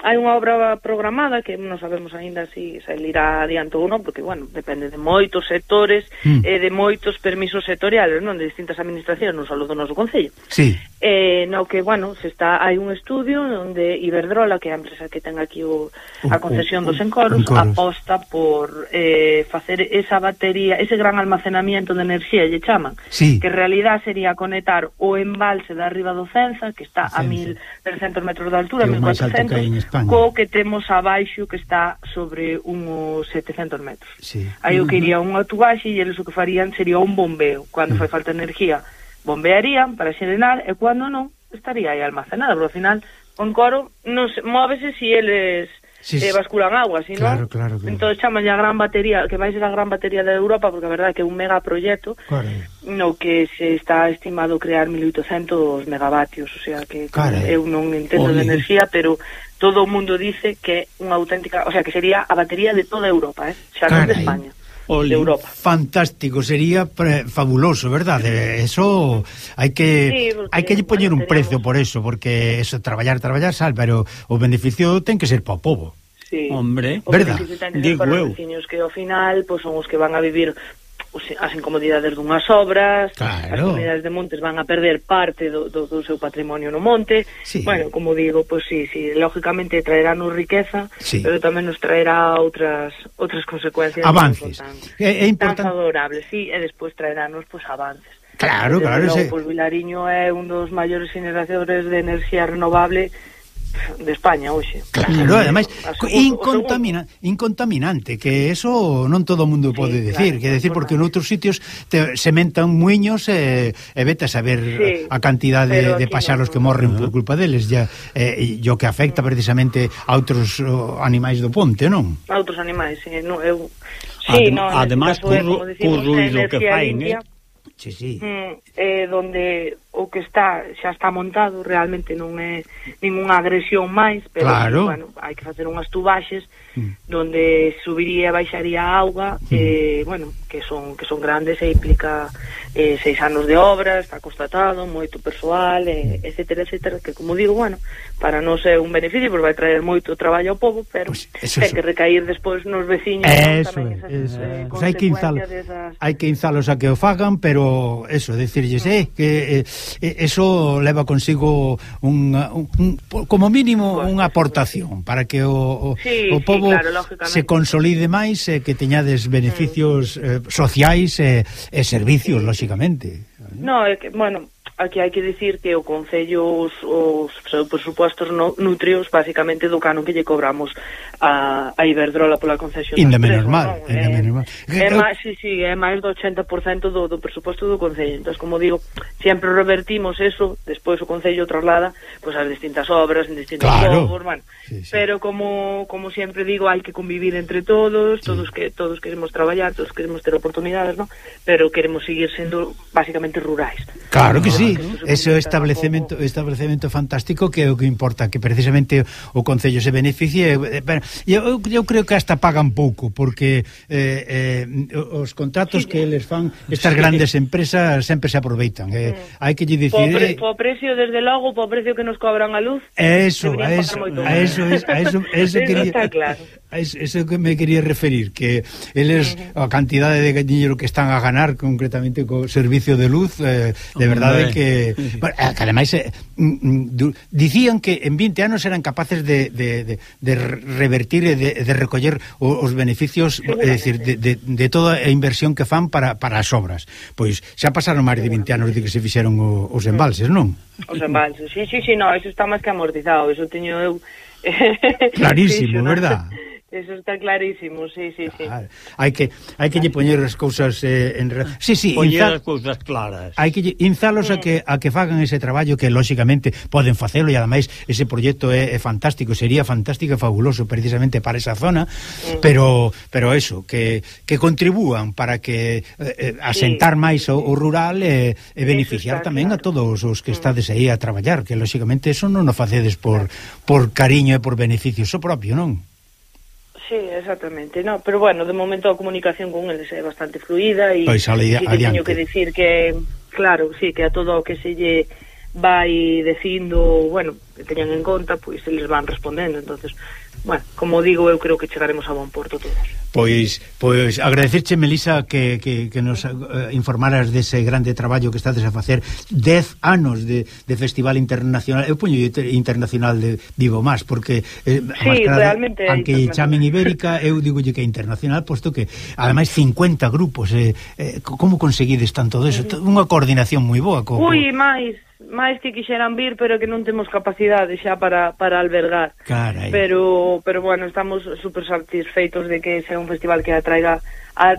Hai unha obra programada que non sabemos aínda se si irá adiante ou non, porque, bueno, depende de moitos sectores mm. e de moitos permisos sectoriales, non? De distintas administracións, non só do noso Concello. Sí. Eh, no que, bueno, se está hai un estudio onde Iberdrola, que é a empresa que ten aquí o, a concesión uh, uh, dos encoros, encoros, aposta por eh, facer esa batería, ese gran almacenamiento de enerxía, lle chaman, sí, que en realidad sería conectar o embalse de arriba do Cenza, que está Cenza, a mil trescentos metros de altura, mil cuatrocentos, co que temos abaixo, que está sobre uns setecentos metros. Sí. Aí o que iría unha tubaxe e eles o que farían sería un bombeo. Cando fai falta energía, bombearían para xerenar, e cando non, estaría aí almacenada, pero ao final o encoro non se, móvese si eles sí, sí. eh, basculan agua, si claro, non? Claro, claro. Entón chaman a gran batería, que vai ser a gran batería de Europa, porque a verdade é que é un megaproxecto, claro, no que se está estimado crear mil oitocentos megavatios, o sea que claro, eu non entendo de enerxía, pero todo o mundo dice que é unha auténtica, o sea, que sería a batería de toda Europa, eh? Xa non de España. Oli, de Europa. Fantástico, sería pre, fabuloso, verdade? Eso hai que sí, hai que poñer un precio por eso, porque eso traballar, traballar sal, pero o beneficio ten que ser para o pobo. Sí. Hombre, o verdad? Digo eu. Os veciños que ao final pues, son os que van a vivir as incomodidades dunhas obras, claro. As comunidades de montes van a perder parte do, do, do seu patrimonio no monte, sí. Bueno, como digo, pues sí, sí, lógicamente traeránnos riqueza, sí. Pero tamén nos traerá outras outras consecuencias avances, é, é importante, tan favorables, sí, e despois traeránnos pues avances. Claro, Desde claro, logo, ese... pues Vilariño é un dos maiores generadores de enerxía renovable de España hoxe. Claro, ademais incontamina, incontaminante, que eso non todo o mundo pode sí, decir, claro, que decir porque en outros sitios te sementan muiños e, e vete a saber sí, a cantidad de, de paxaros no, que morren uh -huh. por culpa deles, ya eh, e o que afecta precisamente a outros uh, animais do ponte, non? A outros animais, sí, no, eu sí, Adem, no, además por ruido que fain, eh? Sí, sí. Mm, eh, donde o que está xa está montado realmente non é ningunha agresión máis, pero claro. sí, bueno, hai que facer unhas tubaxes mm. donde subiría e baixaría a auga, mm. eh, bueno, que son que son grandes e implica eh, seis anos de obra, está constatado, moito persoal, eh, etcétera, etcétera, que como digo, bueno, para non ser un beneficio, porque vai traer moito traballo ao povo, pero pues ten que recair despois nos veciños, eso, tamén esas eso. Eh, pues hai que inzalo, desas... hai que inzalos a que o fagan, pero eso, decirlles, eh, que eh, eso leva consigo un, un, un como mínimo pues, unha aportación para que o, o, sí, o povo sí, claro, se consolide máis e eh, que teñades beneficios eh, sociais e eh, eh, servicios, sí. lógicamente. No, é que, bueno, aquí hai que dicir que o Concello os, os presupostos no, nutrios basicamente do canon que lle cobramos a, a Iberdrola pola concesión. Inda menos mal, no? inda é, menos mal. É máis, sí, sí, é máis do ochenta por cento do, do presuposto do Concello. Entón, como digo, sempre revertimos eso, despois o Concello traslada pues, as distintas obras en distintos claro. povos, bueno, sí, sí. pero como como sempre digo, hai que convivir entre todos, sí. todos que todos queremos traballar, todos queremos ter oportunidades, ¿no? Pero queremos seguir sendo basicamente rurais. Claro que sí, ese establecemento establecemento fantástico que é o que importa, que precisamente o Concello se beneficie. Eu, eu creo que hasta pagan pouco, porque eh, eh, os contratos sí, que eles fan estas grandes empresas sempre se aproveitan. Eh, mm. Hai que lle dicir... Po, pre, po precio, desde logo, po precio que nos cobran a luz... Eso, a eso, a eso, a eso, a eso, eso quería... Está claro. A eso, eso que me quería referir, que eles, uh -huh. a cantidade de dinheiro que están a ganar concretamente co servicio de luz, eh, de verdade que... Bueno, que ademais eh, dicían que en vinte anos eran capaces de, de, de, de revertir e de, de recoller os beneficios, é dicir, de, de, de toda a inversión que fan para, para as obras. Pois xa pasaron máis de vinte anos de que se fixeron o, os embalses, non? Os embalses, sí, sí, sí, no, eso está máis que amortizado, eso teño eu... Clarísimo, sí, verdad? Eso está clarísimo, sí, sí, sí. Ah, hai que hai que lle poñer as cousas eh, en sí, sí, poñer as cousas claras. Hai que inzalos a que a que fagan ese traballo que lógicamente poden facelo, e ademais ese proxecto é, é fantástico, sería fantástico e fabuloso precisamente para esa zona, uh-huh. pero pero eso, que que contribúan para que eh, asentar sí. máis o, o rural e, e beneficiar tamén claro. a todos os que estades aí a traballar, que lógicamente eso non o facedes por por cariño e por beneficio so propio, non? Sí, exactamente, no, pero bueno, de momento a comunicación con eles é bastante fluida e pois, ali, sí que teño que decir que, claro, sí, que a todo o que se lle vai dicindo, bueno, que teñan en conta, pois eles van respondendo, entonces, bueno, como digo, eu creo que chegaremos a bon porto todos. Pois, pois agradecerche, Melisa, que, que, que nos uh, informaras dese grande traballo que estades a facer. Dez anos de, de Festival Internacional, eu poño internacional de Vivo Más, porque eh, sí, realmente aunque chamen Ibérica, eu digolle que é internacional, posto que ademais cincuenta grupos, eh, eh, como conseguides tanto deso? Uh -huh. Unha coordinación moi boa. Co, Ui, máis máis que quixeran vir, pero que non temos capacidade xa para, para albergar. Carai. Pero, pero bueno, estamos super satisfeitos de que sea un festival que atraiga a,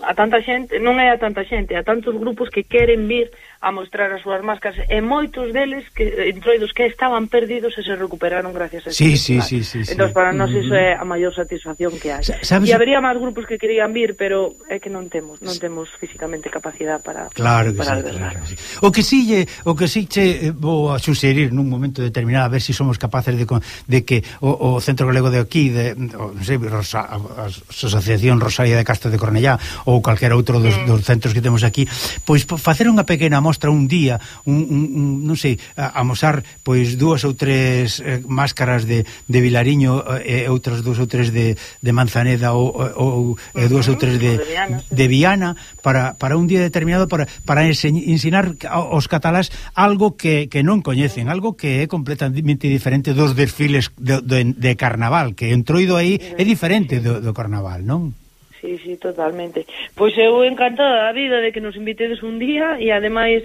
a tanta xente, non é a tanta xente, a tantos grupos que queren vir a mostrar as súas máscaras, e moitos deles, que entroidos que estaban perdidos e se recuperaron gracias a eso. Sí, sí, sí, sí, entón, sí. para nós iso é a maior satisfacción que hai. E habería máis grupos que querían vir, pero é que non temos, non temos físicamente capacidade para Claro que para sí, claro que sí. O que sí, lle, o que sí che vou a suxerir nun momento determinado, a ver se si somos capaces de, de que o, o Centro Galego de aquí, de, o, non sei, Rosa, a Asociación Rosaria de Castro de Cornellá ou calquera outro dos, mm. dos centros que temos aquí, pois facer unha pequena mostra un día, un, un, un non sei, a, amosar pois dúas ou tres eh, máscaras de, de Vilariño e eh, outras dúas ou tres de, de Manzaneda ou, ou eh, dúas ou tres de, de Viana para, para un día determinado para, para ensinar aos catalás algo que, que non coñecen, algo que é completamente diferente dos desfiles de, de, de carnaval, que entroido aí é diferente do, do carnaval, non? Sí, sí, totalmente. Pois eu encantada da vida de que nos invitedes un día e ademais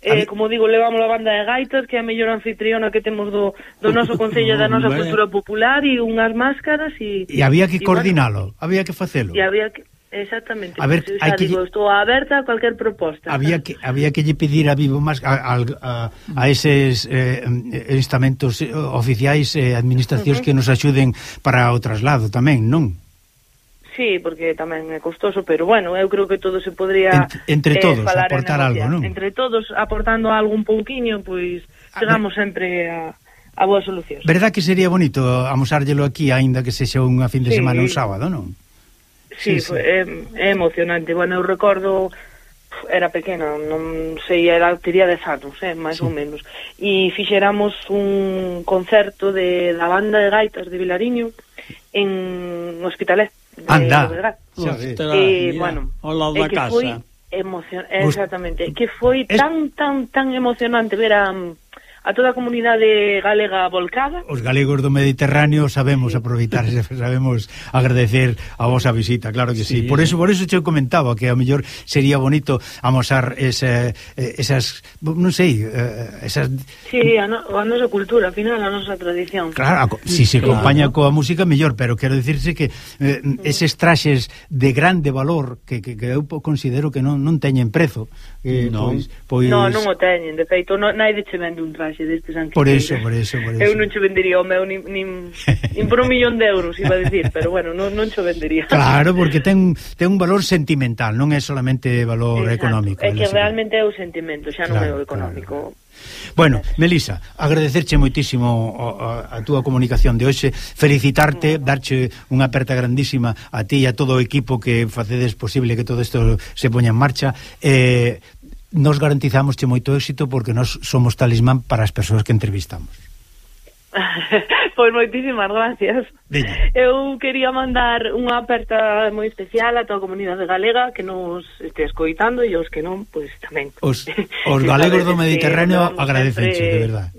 Eh, como digo, levamos a banda de gaitas, que é a mellor anfitriona que temos do, do noso concello, da nosa cultura popular, e unhas máscaras e... E había que coordinalo, bueno, había que facelo. E había que... Exactamente. A ver, pues, hai que... digo, estou aberta a cualquier proposta. Había que había que lle pedir a Vivo Más a, a, a eses eh, estamentos oficiais e eh, administracións uh -huh. que nos axuden para o traslado tamén, non? Sí, porque tamén é costoso, pero bueno, eu creo que todo se podría entre, entre todos eh, aportar algo, non? Entre todos aportando algo un pouquiño, pois chegamos sempre a, a boa solución. Verdad que sería bonito amosárllelo aquí, aínda que sexa unha fin de sí. semana un sábado, non? Sí, sí, sí. É, é emocionante. Bueno, eu recordo, era pequena, non sei, era, tería dez anos, eh, máis sí. ou menos, e fixéramos un concerto de da banda de gaitas de Vilariño en Hospitalet. Anda, e, bueno, ao da casa. Foi emocion... Exactamente, que foi es... tan, tan, tan emocionante ver a, a toda a comunidade galega volcada. Os galegos do Mediterráneo sabemos sí. aproveitar, sabemos agradecer a vosa visita, claro que sí. sí. Por eso por eso che comentaba que a mellor sería bonito amosar ese, esas, non sei, esas... Sí, a, no, a nosa cultura, ao final, a nosa tradición. Claro, si se acompaña claro. coa música, mellor, pero quero dicirse que eh, eses traxes de grande valor que, que, que eu considero que non, non teñen prezo. Eh, no. Pois, pois... no, non o teñen, de feito, non, naide che vende un traxe destes anquillos. Por eso, por eso, por eso. Eu non che vendería o meu nin, nin, nin por un millón de euros, iba a decir, pero bueno, non, non che vendería. Claro, porque ten, ten un valor sentimental, non é solamente valor Exacto. económico. É que realmente é o sentimento, xa non claro, é o económico. Claro. Bueno, Melisa, agradecerche moitísimo a, a, a túa comunicación de hoxe, felicitarte, darche unha aperta grandísima a ti e a todo o equipo que facedes posible que todo isto se poña en marcha. Eh, nos garantizamos che moito éxito porque nós somos talismán para as persoas que entrevistamos. Pois moitísimas gracias. Veña. Eu quería mandar unha aperta moi especial a toda a comunidade galega que nos este escoitando e os que non, pois tamén. Os, os galegos do Mediterráneo agradecenche, sempre... de verdade.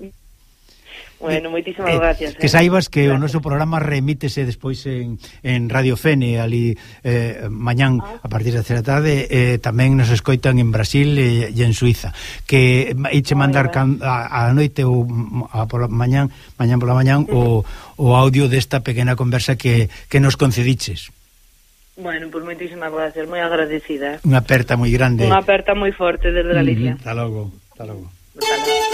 Bueno, moitísimas eh, gracias. Que eh. saibas que gracias. O noso programa remítese despois en, en Radio Fene, ali eh, mañán ah. a partir das tres da tarde, eh, tamén nos escoitan en Brasil e, e en Suiza. Que eiche mandar can, a, a noite ou a pola mañán, mañán pola mañán uh -huh. o, o audio desta pequena conversa que, que nos concediches. Bueno, pois pues moitísimas gracias, moi agradecida. Unha aperta moi grande. Unha aperta moi forte desde Galicia. Uh -huh. Hasta logo, hasta logo. Hasta logo.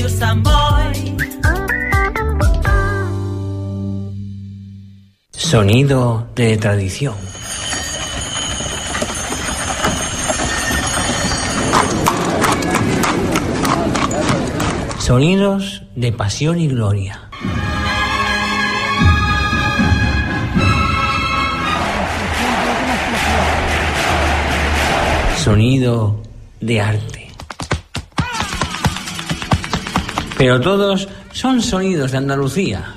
Radio Samboy. Sonido de tradición. Sonidos de pasión y gloria. Sonido de arte. Pero todos son sonidos de Andalucía.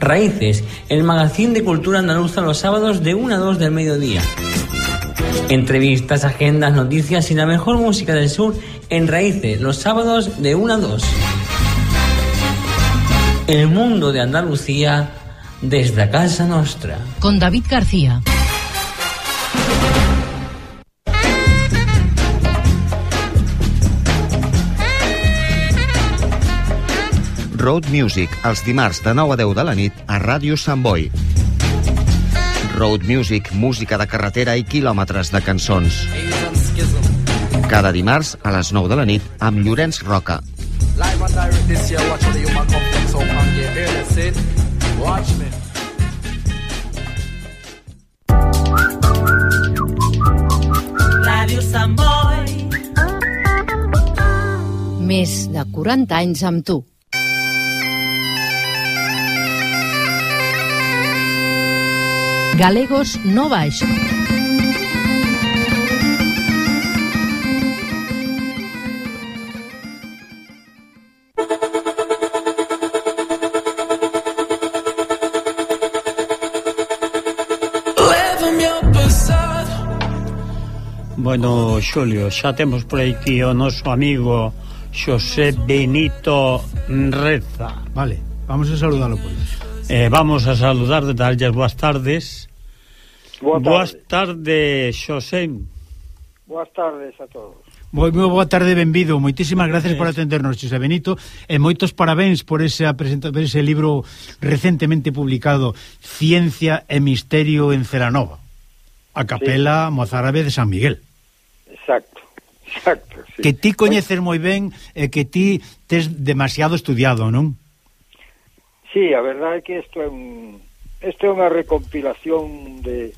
Raíces, el magazín de cultura andaluza los sábados de una a dos del mediodía. Entrevistas, agendas, noticias y la mejor música del sur en Raíces, los sábados de una a dos. El mundo de Andalucía desde a casa nostra. Con David García. Road Music, els dimarts de nou a deu de la nit a Ràdio Sant Boi. Road Music, música de carretera i quilòmetres de cançons. Cada dimarts a les nou de la nit amb Llorenç Roca. Ràdio Sant Boi. Més de quaranta anys amb tu. Galegos no baixo. Bueno, Xulio, xa temos por aquí o noso amigo Xosé Benito Reza. Vale, vamos a saludarlo por eso. Eh, vamos a saludar, de darles boas tardes. Boa tarde. Boas tardes, Xosé. Boas tardes a todos. Moi, moi boa tarde, benvido. Moitísimas gracias por atendernos, Xosé Benito, e moitos parabéns por ese, por ese libro recentemente publicado, Ciencia e Misterio en Celanova, a capela sí. mozárabe de San Miguel. Exacto, exacto. Sí. Que ti coñeces moi ben e que ti tes demasiado estudiado, non? Sí, a verdade é que isto é un isto é unha recompilación de,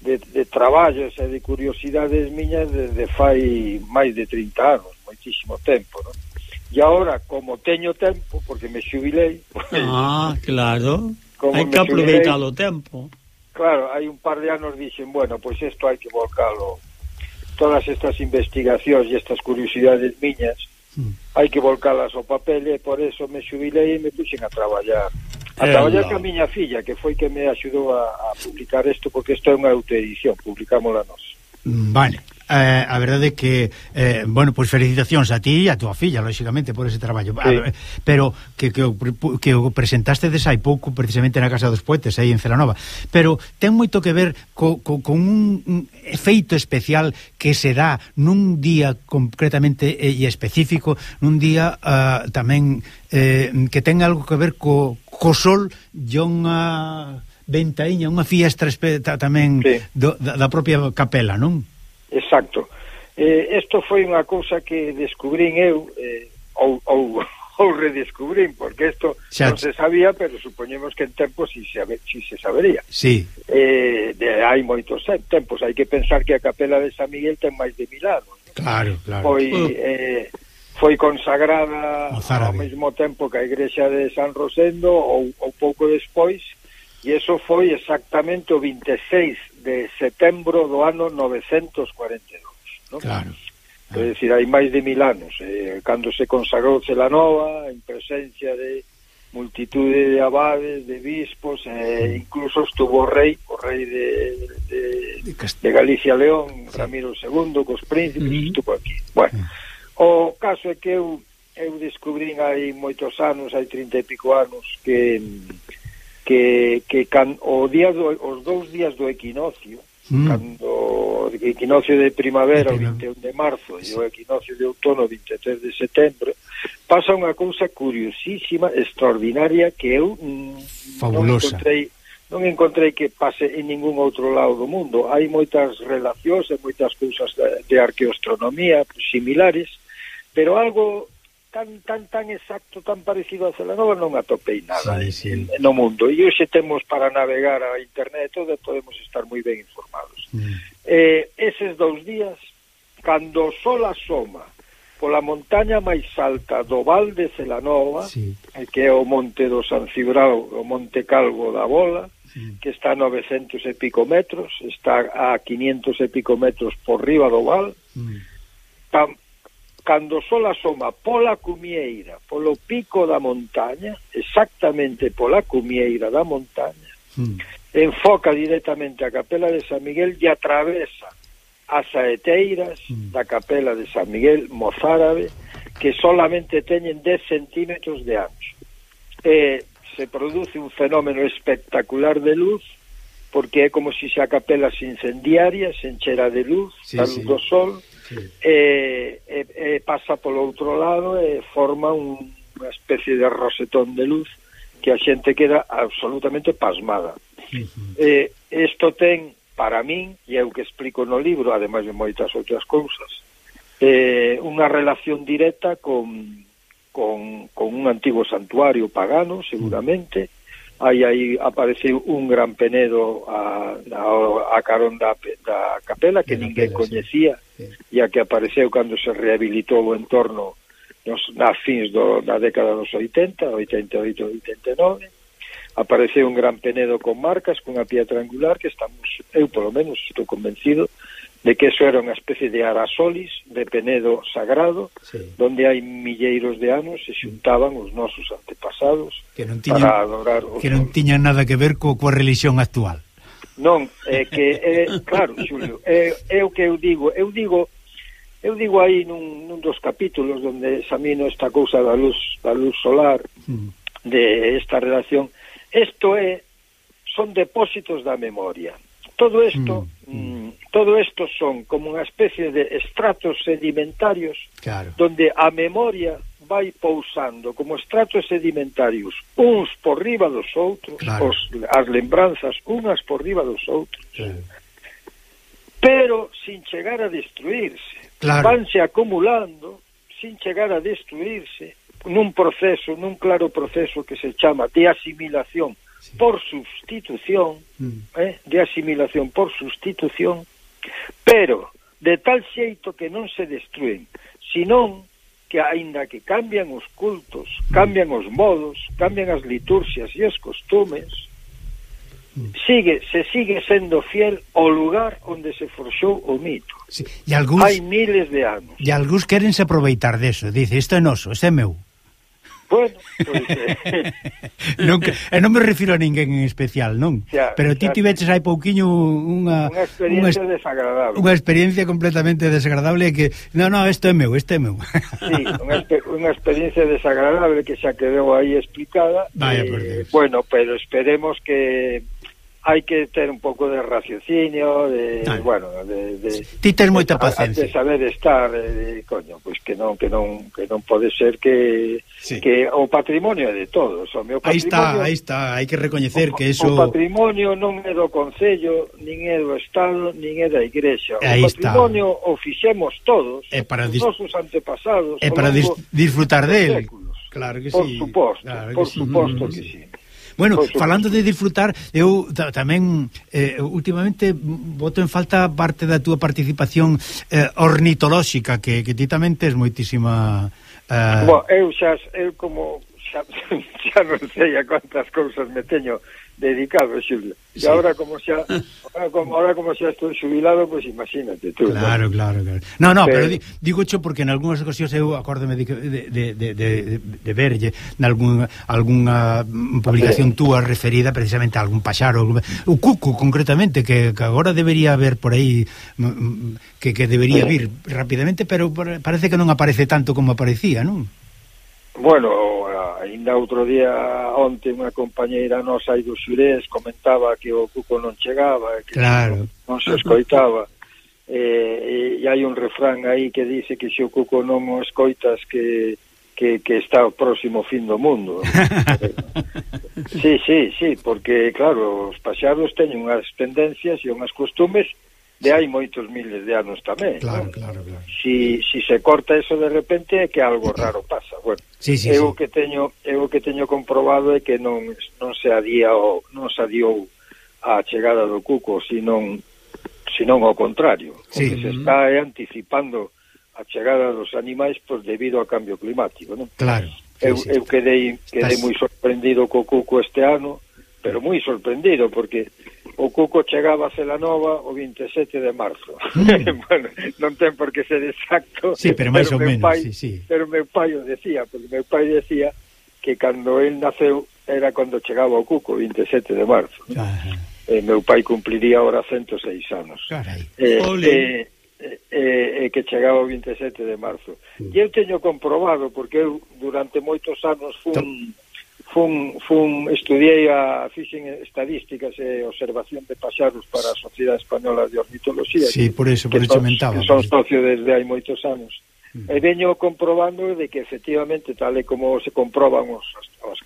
de, de traballos e de curiosidades miñas desde fai máis de trinta anos, moitísimo tempo, non? E agora, como teño tempo, porque me xubilei... Ah, claro, hai que aproveitar o tempo. Claro, hai un par de anos dixen, bueno, pois pues isto hai que volcalo, todas estas investigacións e estas curiosidades miñas, hai que volcalas ao papel, e por eso me xubilei e me puxen a traballar a traballar ca miña filla, que foi que me axudou a, a publicar isto, porque isto é unha autoedición, publicámola nós. Vale, eh, a verdade é que eh, bueno, pois pues felicitacións a ti e a tua filla, lógicamente, por ese traballo, sí. a, pero que, que, o, que o presentaste des hai pouco precisamente na Casa dos Poetes, aí en Celanova, pero ten moito que ver co, co, con un, un efeito especial que se dá nun día concretamente e específico, nun día uh, tamén eh, que ten algo que ver co, co sol e unha ventaíña, unha fiestra tamén sí. do, da, da propia capela, non? Exacto. Eh, isto foi unha cousa que descubrín eu, eh, ou, ou, ou redescubrín, porque isto xa non se sabía, pero supoñemos que en tempo si se, si se sabería. Sí. Eh, de, hai moitos tempos, hai que pensar que a capela de San Miguel ten máis de mil anos. ¿no? Claro, claro. Foi... Eh, foi consagrada ao mesmo tempo que a igrexa de San Rosendo, ou, ou pouco despois, e eso foi exactamente o vinte e seis de setembro do ano novecentos cuarenta e dous, ¿no? Claro. É dicir, hai máis de mil anos, eh, cando se consagrou Celanova, en presencia de multitude de abades, de bispos, eh, incluso estuvo o rei, o rei de, de, de Galicia León, sí. Ramiro segundo, cos príncipes, uh-huh. estuvo aquí. Bueno, uh-huh. o caso é que eu, eu descubrín hai moitos anos, hai trinta e pico anos, que... que, que can, o día do, os dous días do equinoccio, mm. cando o equinoccio de primavera o vinte e un de marzo e o equinoccio de outono o vinte e tres de setembro, pasa unha cousa curiosísima, extraordinaria, que eu mm, non encontrei non encontrei que pase en ningún outro lado do mundo. Hai moitas relacións e moitas cousas de, de arqueoastronomía similares, pero algo tan tan tan exacto, tan parecido a Celanova non atopei nada sí, sí. En, no mundo. E hoxe temos para navegar a internet todo, podemos estar moi ben informados. Mm. Eh, eses dous días, cando o sol asoma pola montaña máis alta do Val de Celanova, sí. que é o monte do San Cibrao, o Monte Calvo da Bola, sí. que está a novecentos e pico metros, está a quinientos e pico metros por riba do Val, mm. tam, cando o sol asoma pola cumieira, polo pico da montaña, exactamente pola cumieira da montaña, mm. enfoca directamente a Capela de San Miguel e atravesa as saeteiras mm. da Capela de San Miguel mozárabe, que solamente teñen dez centímetros de ancho. Eh, se produce un fenómeno espectacular de luz, porque é como se a capela se incendiaria, se enchera de luz, sí, a luz sí. do sol, sí. e, e, e pasa polo outro lado e forma un, unha especie de rosetón de luz que a xente queda absolutamente pasmada. Uh-huh. Eh, isto ten, para min, e é o que explico no libro, ademais de moitas outras cousas, eh, unha relación directa con, con, con un antigo santuario pagano, seguramente. Aí aí apareceu un gran penedo a, a, a carón da, da capela que ninguén coñecía, sí. Sí. e a que apareceu cando se rehabilitou o entorno nos, nas fins do, da década dos oitenta, oitenta e oito, oitenta e nove. Apareceu un gran penedo con marcas, cunha pía triangular, que estamos, eu polo menos estou convencido de que eso era unha especie de arasolis de penedo sagrado, sí. donde hai milleiros de anos se xuntaban os nosos antepasados que non tiñan, para adorar os que non tiñan nada que ver co, coa religión actual. Non, é que é, claro, Xulio, é, é o que eu digo, eu digo eu digo aí nun, nun dos capítulos onde examino esta cousa da luz, da luz solar, mm. de esta relación. Isto é, son depósitos da memoria. Todo isto, mm, mm. todo isto son como unha especie de estratos sedimentarios, claro. donde a memoria vai pousando como estratos sedimentarios uns por riba dos outros, claro. os, as lembranzas unhas por riba dos outros, claro. pero sin chegar a destruirse. Claro. Vanse acumulando sin chegar a destruirse nun proceso, nun claro proceso que se chama de asimilación por sustitución, mm. eh, de asimilación por sustitución, pero de tal xeito que non se destruen, senón que aínda que cambian os cultos, cambian os modos, cambian as liturxias e os costumes, mm. sigue, se sigue sendo fiel ao lugar onde se forxou o mito. Sí. E algúns, hai miles de anos. E algúns querense aproveitar deso, dice, isto é noso, isto é meu. Bueno, pois eh. non, e non me refiro a ninguén en especial, non? Xa, pero ti tiveches hai pouquiño unha unha experiencia unha, desagradable. Unha experiencia completamente desagradable que, no, no, isto é meu, isto é meu. Sí, unha, unha experiencia desagradable que xa quedou aí explicada. Vaya, eh, por Dios. Bueno, pero esperemos que hai que ter un pouco de raciocinio, de, ah, bueno, de, de ti tes moita paciencia. De saber estar, de, coño, pois pues que non que non que non pode ser que sí. que o patrimonio é de todos, o meu patrimonio. Aí está, aí está, hai que recoñecer o, que eso o patrimonio non é do concello, nin é do estado, nin é da igrexa. Aí o patrimonio está. O fixemos todos, é para os dis... nosos antepasados. É para dis... disfrutar del. Claro que por sí. Suposto, claro por que suposto sí. que sí. Bueno, falando de disfrutar, eu tamén eh, últimamente boto en falta parte da túa participación eh, ornitolóxica, que, que ti tamén tes moitísima... Eh... Bueno, eu xa, eu como xa, xa non sei a quantas cousas me teño dedicado, Xulio. E sí. agora como xa ahora como, ahora como xa estou xubilado, pois pues imagínate tú. Claro, ¿no? claro, claro. No, no, pero, pero digo cho porque en algunhas ocasións eu acórdome de, de, de, de, de, de verlle nalgún algunha publicación túa referida precisamente a algún paxaro, o cuco concretamente, que, que agora debería haber por aí que, que debería vir rapidamente, pero parece que non aparece tanto como aparecía, non? Bueno, ainda outro día onte unha compañeira nosa aí do Xurés comentaba que o cuco non chegaba, que claro. non se escoitaba, e, e hai un refrán aí que dice que se o cuco non o escoitas que, que, que está o próximo fin do mundo. Sí, sí, sí, porque claro, os paxaros teñen unhas tendencias e unhas costumes de hai moitos miles de anos tamén. Claro, ¿no? claro, claro. Si, si se corta eso de repente é que algo raro pasa. Bueno, sí, sí, eu sí. que teño eu que teño comprobado é que non non se adía o non se adiou a chegada do cuco, senón senón ao contrario. Sí. O que se está é anticipando a chegada dos animais pois debido ao cambio climático, non? Claro. Sí, eu, sí. eu quedei quedei Estás... moi sorprendido co cuco este ano, pero moi sorprendido porque o cuco chegaba a Celanova o veintisiete de marzo. Mm. Bueno, non ten por que ser exacto. Sí, pero máis ou menos, pai, sí, sí. Pero meu pai o decía, porque meu pai decía que cando él naceu era cando chegaba o cuco, veintisiete de marzo. Ajá. Eh, meu pai cumpliría ahora ciento seis anos. Carai. Eh, eh, eh, eh, que chegaba o veintisiete de marzo. Mm. E eu teño comprobado, porque eu durante moitos anos fun... Fun, fun, estudiei a fixen estadísticas e observación de paxaros para a Sociedade Española de Ornitoloxía. Sí, por eso, por eso mentaba. Que son socio desde hai moitos anos. Mm. E veño comprobando de que efectivamente, tal e como se comproban os, os, os,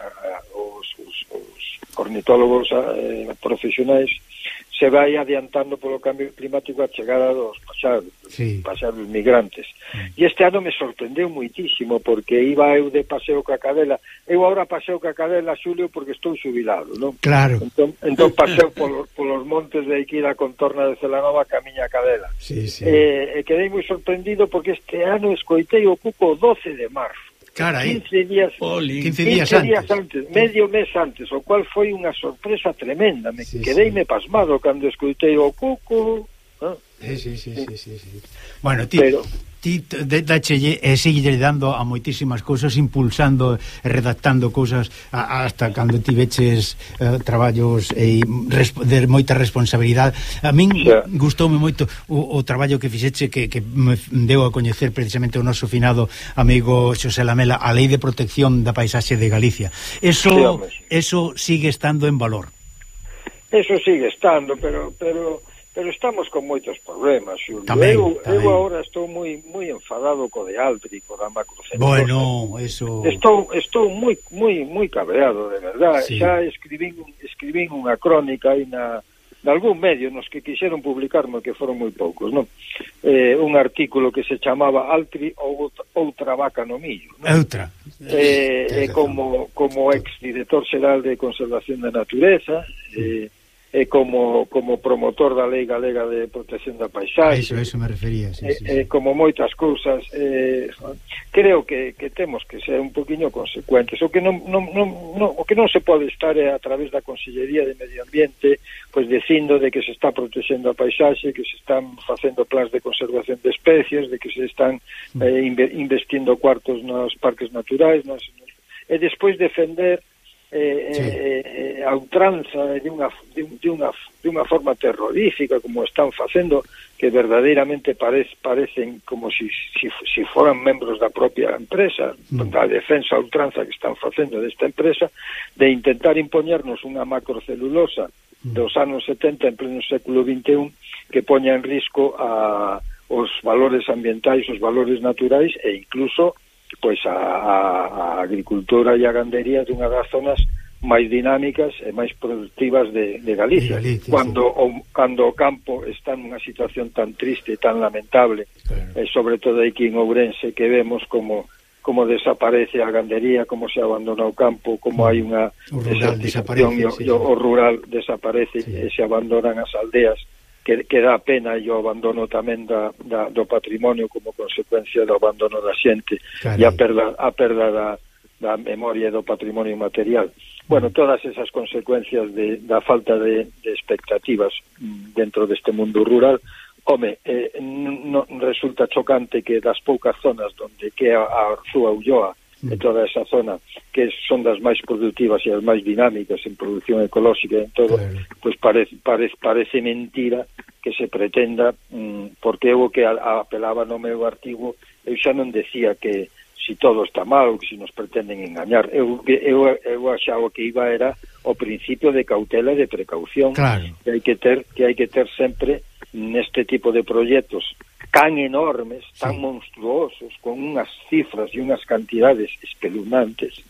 os, os ornitólogos eh, profesionais, se vai adiantando polo cambio climático a chegada dos paxaros, sí. paxaros migrantes. Mm. E este ano me sorprendeu muitísimo, porque iba eu de paseo ca cadela. Eu agora paseo ca cadela, Xulio, porque estou xubilado, non? Claro. Entón, entón paseo polos, polos montes de aquí da contorna de Celanova ca miña cadela. Sí, sí. E, e quedei moi sorprendido porque este ano escoitei o cuco doce de marzo. Carai. quince días, quince días, quince días antes. antes, medio mes antes, o cual foi unha sorpresa tremenda. Me sí, quedeime sí. pasmado cando escoitei o cuco. ¿No? Sí, sí, sí, sí, sí, sí. Bueno, ti, Pero... ti dachelle e sigue dando a moitísimas cousas, impulsando e redactando cousas a, hasta cando ti veches uh, traballos e resp de moita responsabilidade. A min yeah. gustoume moito o, o traballo que fixeche que, que me deu a coñecer precisamente o noso finado amigo Xosé Lamela, a Lei de Protección da Paisaxe de Galicia. Eso, sí, eso sigue estando en valor. Eso sigue estando, pero... pero... Pero estamos con moitos problemas, Xulio. Tamén, eu, tamén. eu agora estou moi moi enfadado co de Altri, co da macrocelulosa. Bueno, eso... Estou estou moi moi moi cabreado, de verdad. Sí. Xa escribín escribín unha crónica aí na de algún medio nos que quixeron publicarme, que foron moi poucos, non? Eh, un artículo que se chamaba Altri ou outra vaca no millo, non? Outra. Eh, eh, como como ex director xeral de Conservación da Natureza, eh e como como promotor da Lei Galega de Protección da Paisaxe. Eso, eso me refería, sí, e, sí, sí. E como moitas cousas, eh, creo que, que temos que ser un poquinho consecuentes. O que non, non, non, non, o que non se pode estar é a través da Consellería de Medio Ambiente pois dicindo de que se está protexendo a paisaxe, que se están facendo plans de conservación de especies, de que se están eh, investindo cuartos nos parques naturais, nos, nos, e despois defender Eh, sí. eh, a ultranza de unha, de, de, unha, de unha forma terrorífica como están facendo, que verdadeiramente parece, parecen como si, si, si foran membros da propia empresa, mm. da defensa a ultranza que están facendo desta empresa, de intentar impoñernos unha macrocelulosa mm. dos anos setenta en pleno século vinte e un que poña en risco a, os valores ambientais, os valores naturais e incluso pois a, a, a agricultura e a gandería dunha das zonas máis dinámicas e máis productivas de, de Galicia, de Galicia cando, sí. o, cando o campo está nunha situación tan triste e tan lamentable, claro. E sobre todo aquí en Ourense, que vemos como como desaparece a gandería, como se abandona o campo, como hai unha desertización e o, sí, o rural desaparece, sí. E se abandonan as aldeas, que, que dá pena, e o abandono tamén da, da, do patrimonio como consecuencia do abandono da xente. Carai. E a perda, a perda da, da memoria e do patrimonio material. Bueno, todas esas consecuencias de, da falta de, de expectativas dentro deste mundo rural, home, eh, non resulta chocante que das poucas zonas donde que a, a Arzúa, Ulloa, e toda esa zona que son das máis productivas e as máis dinámicas en produción ecolóxica e en todo, claro. Pois parece, parece, parece mentira que se pretenda, mmm, porque eu que a, a apelaba no meu artigo, eu xa non decía que si todo está mal ou que si nos pretenden engañar, eu, eu, eu axaba que iba era o principio de cautela e de precaución, claro. que hai que ter que hai que ter sempre neste tipo de proxectos tan enormes, tan sí. monstruosos, con unhas cifras e unhas cantidades espeluznantes,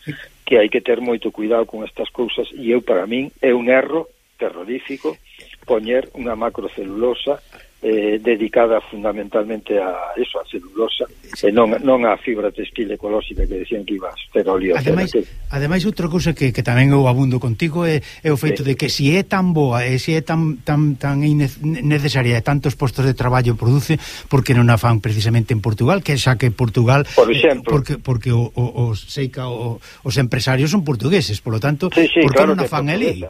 que hai que ter moito cuidado con estas cousas, e eu, para min, é un erro terrorífico poñer unha macrocelulosa eh, dedicada fundamentalmente a eso, a celulosa, e non, non a fibra textil ecolóxica que decían que iba a ser oleosa. Ademais, que... ademais outra cousa que, que tamén eu abundo contigo é, é o feito sí. de que se é tan boa e se é tan, tan, tan necesaria e tantos postos de traballo produce, porque non a fan precisamente en Portugal, que xa que Portugal, por exemplo, eh, porque, porque o, o, o, seica, o, os empresarios son portugueses, polo tanto, sí, sí, porque claro non a fan ali?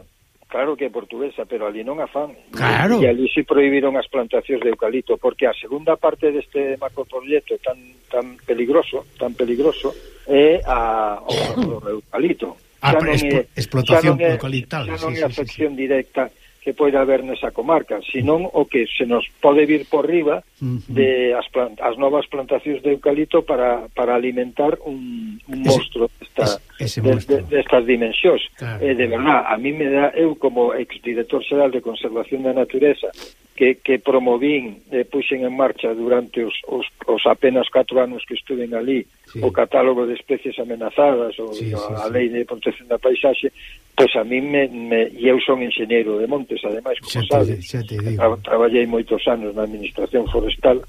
Claro que é portuguesa, pero ali non a fan. Claro. E ali se prohibiron as plantacións de eucalipto, porque a segunda parte deste macroproxecto tan tan peligroso, tan peligroso, é a, o, o eucalipto. A ah, é, explotación eucaliptal. Xa non é a afección sí, sí. directa que pode haber nesa comarca, senón o que se nos pode vir por riba uh-huh. de as, plant, as novas plantacións de eucalipto para, para alimentar un, un monstro desta, ese, ese de, monstro. de, destas dimensións. Claro. Eh, de verdad, a mí me dá, eu como exdirector xeral de Conservación da Natureza, que, que promovín e eh, puxen en marcha durante os, os, os apenas catro anos que estuven ali, sí. o catálogo de especies amenazadas, ou sí, sí, a sí. Lei de protección da paisaxe, pois a mí me, me e eu son enxeñeiro de montes, ademais, como sabes, tra, traballei moitos anos na administración forestal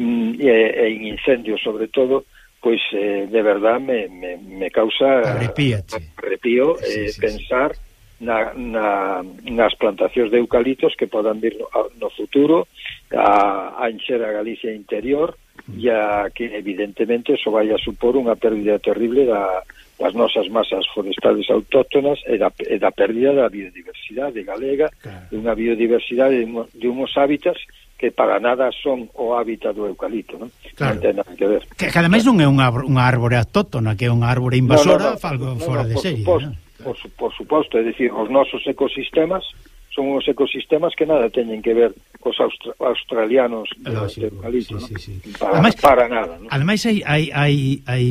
mm, e, e en incendios sobre todo, pois eh, de verdad me, me, me causa arrepío eh, sí, sí, pensar sí. Na, na, nas plantacións de eucaliptos que podan vir no, no futuro a, a encher a Galicia interior mm. e a que evidentemente eso vai a supor unha pérdida terrible da das nosas masas forestales autóctonas e da, e da pérdida da biodiversidade galega, claro. de unha biodiversidade de, de uns hábitats que para nada son o hábitat do eucalipto, non? Claro. Non ten nada que ver. Que, que ademais non é unha, unha árbore autóctona, que é unha árbore invasora, no, no, no, falgo no, fora no, de serie. Suposto, ¿no? por, por suposto, é dicir, os nosos ecosistemas son uns ecosistemas que nada teñen que ver cos austra australianos de eucalipto, sí, sí, sí. Para, ademais, para nada, ¿no? Ademais hai, hai, hai, hai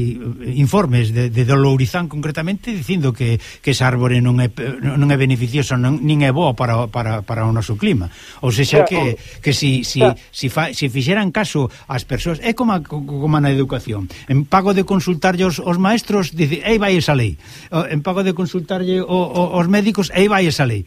informes de, de Lourizán concretamente dicindo que, que esa árbore non é, non é beneficiosa, non, nin é boa para, para, para o noso clima, ou seja que, que si, si, si, fa, si fixeran caso ás persoas, é como, como na educación, en pago de consultarlle os, os maestros, dice, aí vai esa lei, en pago de consultarlle o, o, os médicos, aí vai esa lei.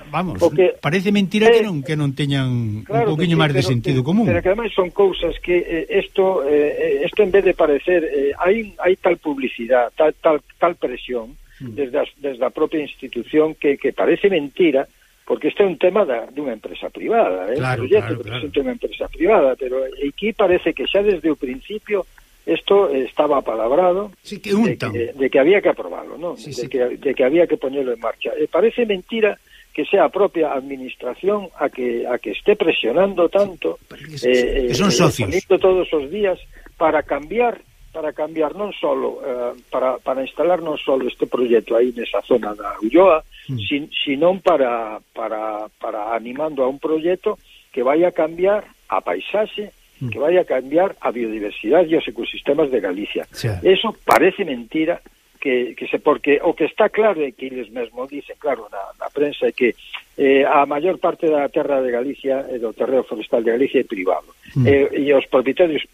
Vamos, porque, parece mentira eh, que non que non teñan claro, un poquinho máis de sentido que, común. Pero que ademais son cousas que isto eh, esto eh, en vez de parecer eh, hai hai tal publicidade, tal tal tal presión mm. desde a, desde a propia institución que que parece mentira, porque este é un tema da dunha empresa privada, eh, claro, proxecto claro, que claro. unha empresa privada, pero aquí parece que xa desde o principio esto estaba apalabrado sí, que de, que, de que había que aprobarlo, ¿no? Sí, de, sí. Que, de que había que ponerlo en marcha. Eh, parece mentira que sea a propia administración a que a que esté presionando tanto, eh, que son socios eh, todos os días para cambiar para cambiar non solo eh, para, para instalar non solo este proxecto aí nesa zona da Ulloa, mm. sin, sino para, para, para animando a un proxecto que vai a cambiar a paisaxe, mm. que vai a cambiar a biodiversidade e os ecosistemas de Galicia. Sí. Eso parece mentira. Que, que se porque o que está claro é que eles mesmos dicen, claro, na, na prensa é que eh, a maior parte da terra de Galicia e do terreo forestal de Galicia é privado mm. e, e os propietarios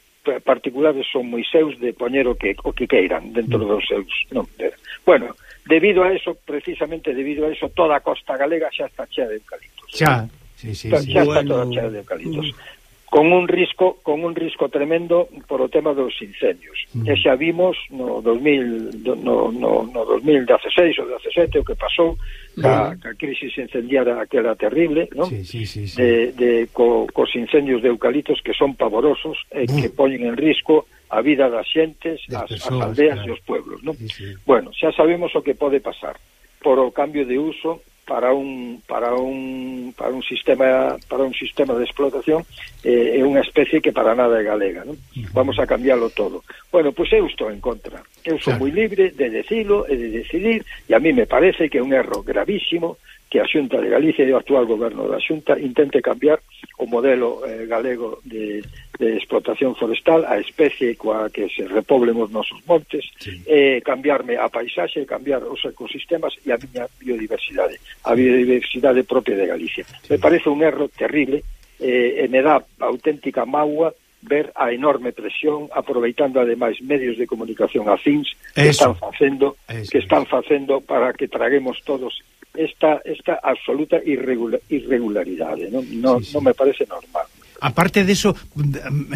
particulares son moi seus de poñer o que, o que queiran dentro mm. dos seus non, de, bueno, debido a eso, precisamente debido a eso, toda a costa galega xa está chea de eucaliptos xa, sí, sí, xa, sí. xa bueno. está toda chea de eucaliptos mm. con un risco con un risco tremendo por o tema dos incendios. Mm. E xa vimos no dos mil no no no dos mil dieciséis ou diecisiete o que pasou ca, ca crisis incendiaria aquela terrible, ¿no? Sí, sí, sí, sí. De de co, cos incendios de eucaliptos que son pavorosos e mm. que poñen en risco a vida das xentes, as, persoas, as aldeas claro. E os pueblos, ¿no? Sí, sí. Bueno, xa sabemos o que pode pasar por o cambio de uso para un para un para un sistema para un sistema de explotación é eh, unha especie que para nada é galega, non? Uh-huh. Vamos a cambiarlo todo. Bueno, pois pues eu estou en contra. Eu sou claro. moi libre de decilo e de decidir, e a mí me parece que é un erro gravísimo que a Xunta de Galicia e o actual goberno da Xunta intente cambiar o modelo eh, galego de, de explotación forestal, a especie coa que se repoblen os nosos montes, sí. eh, cambiarme a paisaxe, cambiar os ecosistemas e a miña biodiversidade, a biodiversidade propia de Galicia. Sí. Me parece un erro terrible eh, e me dá auténtica mágoa ver a enorme presión aproveitando ademais medios de comunicación afíns que Eso. están facendo Eso. que están facendo para que traguemos todos esta, esta absoluta irregular, irregularidade, non, non, sí, sí. non me parece normal. Aparte deso,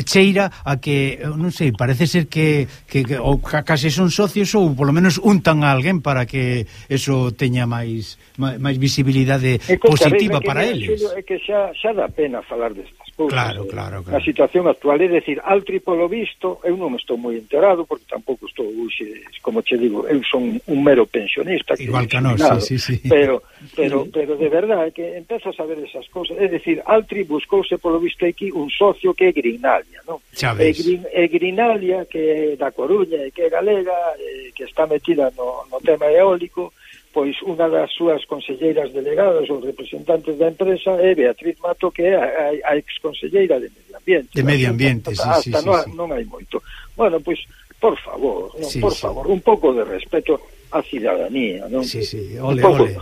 cheira a que, non sei, parece ser que, que, que ou case son socios ou polo menos untan a alguén para que eso teña máis máis visibilidade positiva para eles. É que xa, xa dá pena falar destas cousas. Claro, claro, claro. Na situación actual, é dicir, Altri polo visto, eu non estou moi enterado, porque tampouco estou, uxe, como che digo, eu son un mero pensionista. Igual que nós, sí, sí, sí. Pero, pero, pero de verdade, que empezo a saber esas cousas. É dicir, Altri buscouse polo visto aquí un socio que é Grinalia, non? É, Grin, é Grinalia, que é da Coruña e que é galega, e que está metida no, no tema eólico, pois unha das súas conselleiras delegadas ou representantes da empresa é Beatriz Mato, que é a, a ex-conselleira de Medio Ambiente. De Medio Ambiente, sí, hasta sí, sí, non, sí. non hai moito. Bueno, pois, por favor, non, sí, por sí. favor, un pouco de respeto á cidadanía, non? Sí, sí, ole, ole.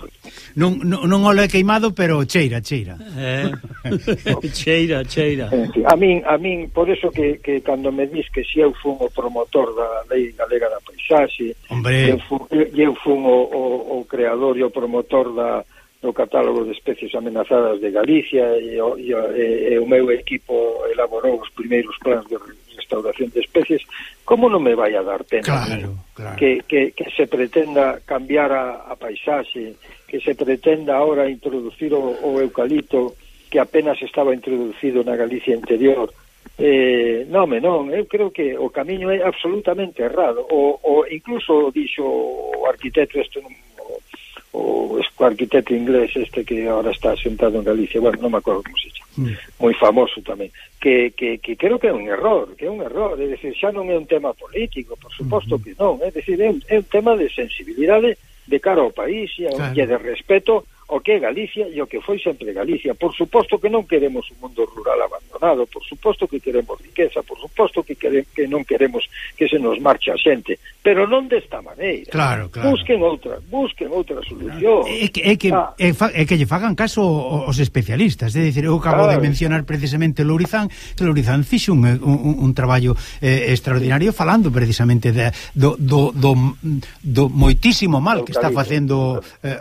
Non, non, non ole queimado, pero cheira, cheira. Eh, cheira, cheira. A min, a min, por eso que, que cando me dis que si eu fun o promotor da Lei Galega da Paisaxe, eu fun, eu fun o, o, o creador e o promotor da, do catálogo de especies amenazadas de Galicia, e o, e, e, e o meu equipo elaborou os primeiros plans de restauración de especies, como non me vai a dar pena claro, claro. Que, que, que se pretenda cambiar a, a paisaxe, que se pretenda ahora introducir o, o eucalipto que apenas estaba introducido na Galicia interior. Eh, non, non, eu creo que o camiño é absolutamente errado. O, o incluso dixo o arquitecto este, o, o arquitecto inglés este que ahora está sentado en Galicia, bueno, non me acordo como se chama, mm. moi famoso tamén, que, que, que creo que é un error, que é un error, é dicir, xa non é un tema político, por suposto mm-hmm. que non, é dicir, é un, é un tema de sensibilidade de cara ao país e, claro. E de respeto o que é Galicia e o que foi sempre Galicia. Por suposto que non queremos un mundo rural abandonado, por suposto que queremos riqueza, por suposto que, quere, que non queremos que se nos marche a xente, pero non desta maneira. Claro, claro. Busquen outra, busquen outra solución. É que, é que, ah. é, é que lle fagan caso os especialistas, é dicir, eu acabo claro. de mencionar precisamente Lourizán, que Lourizán fixe un, un, un traballo eh, extraordinario falando precisamente de, do, do, do, do moitísimo mal que está facendo eh,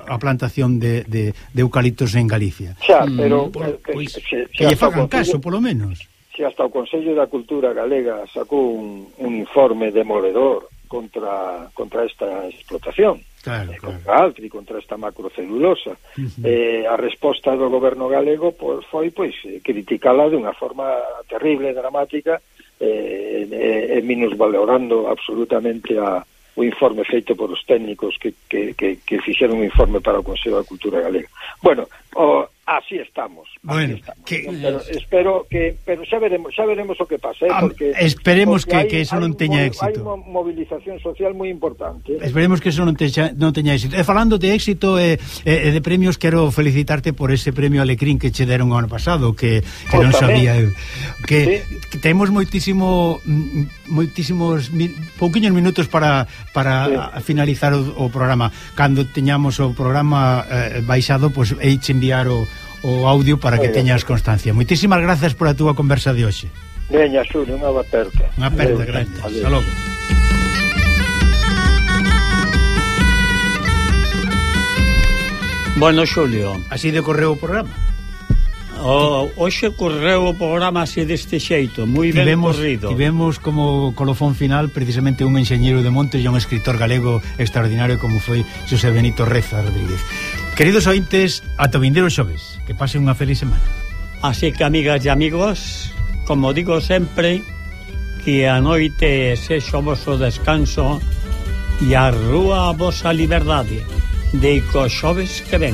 a plantación de, de, de eucaliptos en Galicia. Xa, pero... Mm, por, pois, que, que lle fagan caso, polo menos. Si hasta o Consello da Cultura Galega sacou un, un informe demoledor contra contra esta explotación, claro, eh, claro. contra Altri, contra esta macrocelulosa. Uh-huh. Eh, a resposta do goberno galego pois, foi pois criticala de unha forma terrible, dramática, eh, e, e minusvalorando absolutamente a o informe feito por os técnicos que, que, que, que fixeron un informe para o Consello da Cultura Galega. Bueno, o, así estamos. Bueno, así estamos, que... ¿no? Pero espero que pero xa veremos, xa veremos o que pasa, ¿eh? porque esperemos porque que, hay, que eso non teña éxito. Hai unha movilización social moi importante. ¿eh? Esperemos que eso non teña, non teña éxito. E falando de éxito e eh, eh, de premios, quero felicitarte por ese premio Alecrín que che deron o ano pasado, que, que non sabía eu. Que, sí. que temos moitísimo moitísimos pouquiños minutos para para sí. finalizar o, o programa. Cando teñamos o programa eh, baixado, pois pues, eiche enviar o, o audio para que teñas constancia. Moitísimas grazas por a túa conversa de hoxe. Veña, Xulio, unha aperta. Unha aperta grande. Hasta logo. Bueno, Xulio, así decorreu o programa. O, hoxe correu o programa así deste xeito, moi ben tivemos, corrido. Tivemos como colofón final precisamente un enxeñeiro de montes e un escritor galego extraordinario como foi Xosé Benito Reza Rodríguez. Queridos ointes, ata o vindeiro xoves, que pasen unha feliz semana. Así que, amigas e amigos, como digo sempre, que a noite sexo o voso descanso e a rúa a vosa liberdade. De co xoves que ven.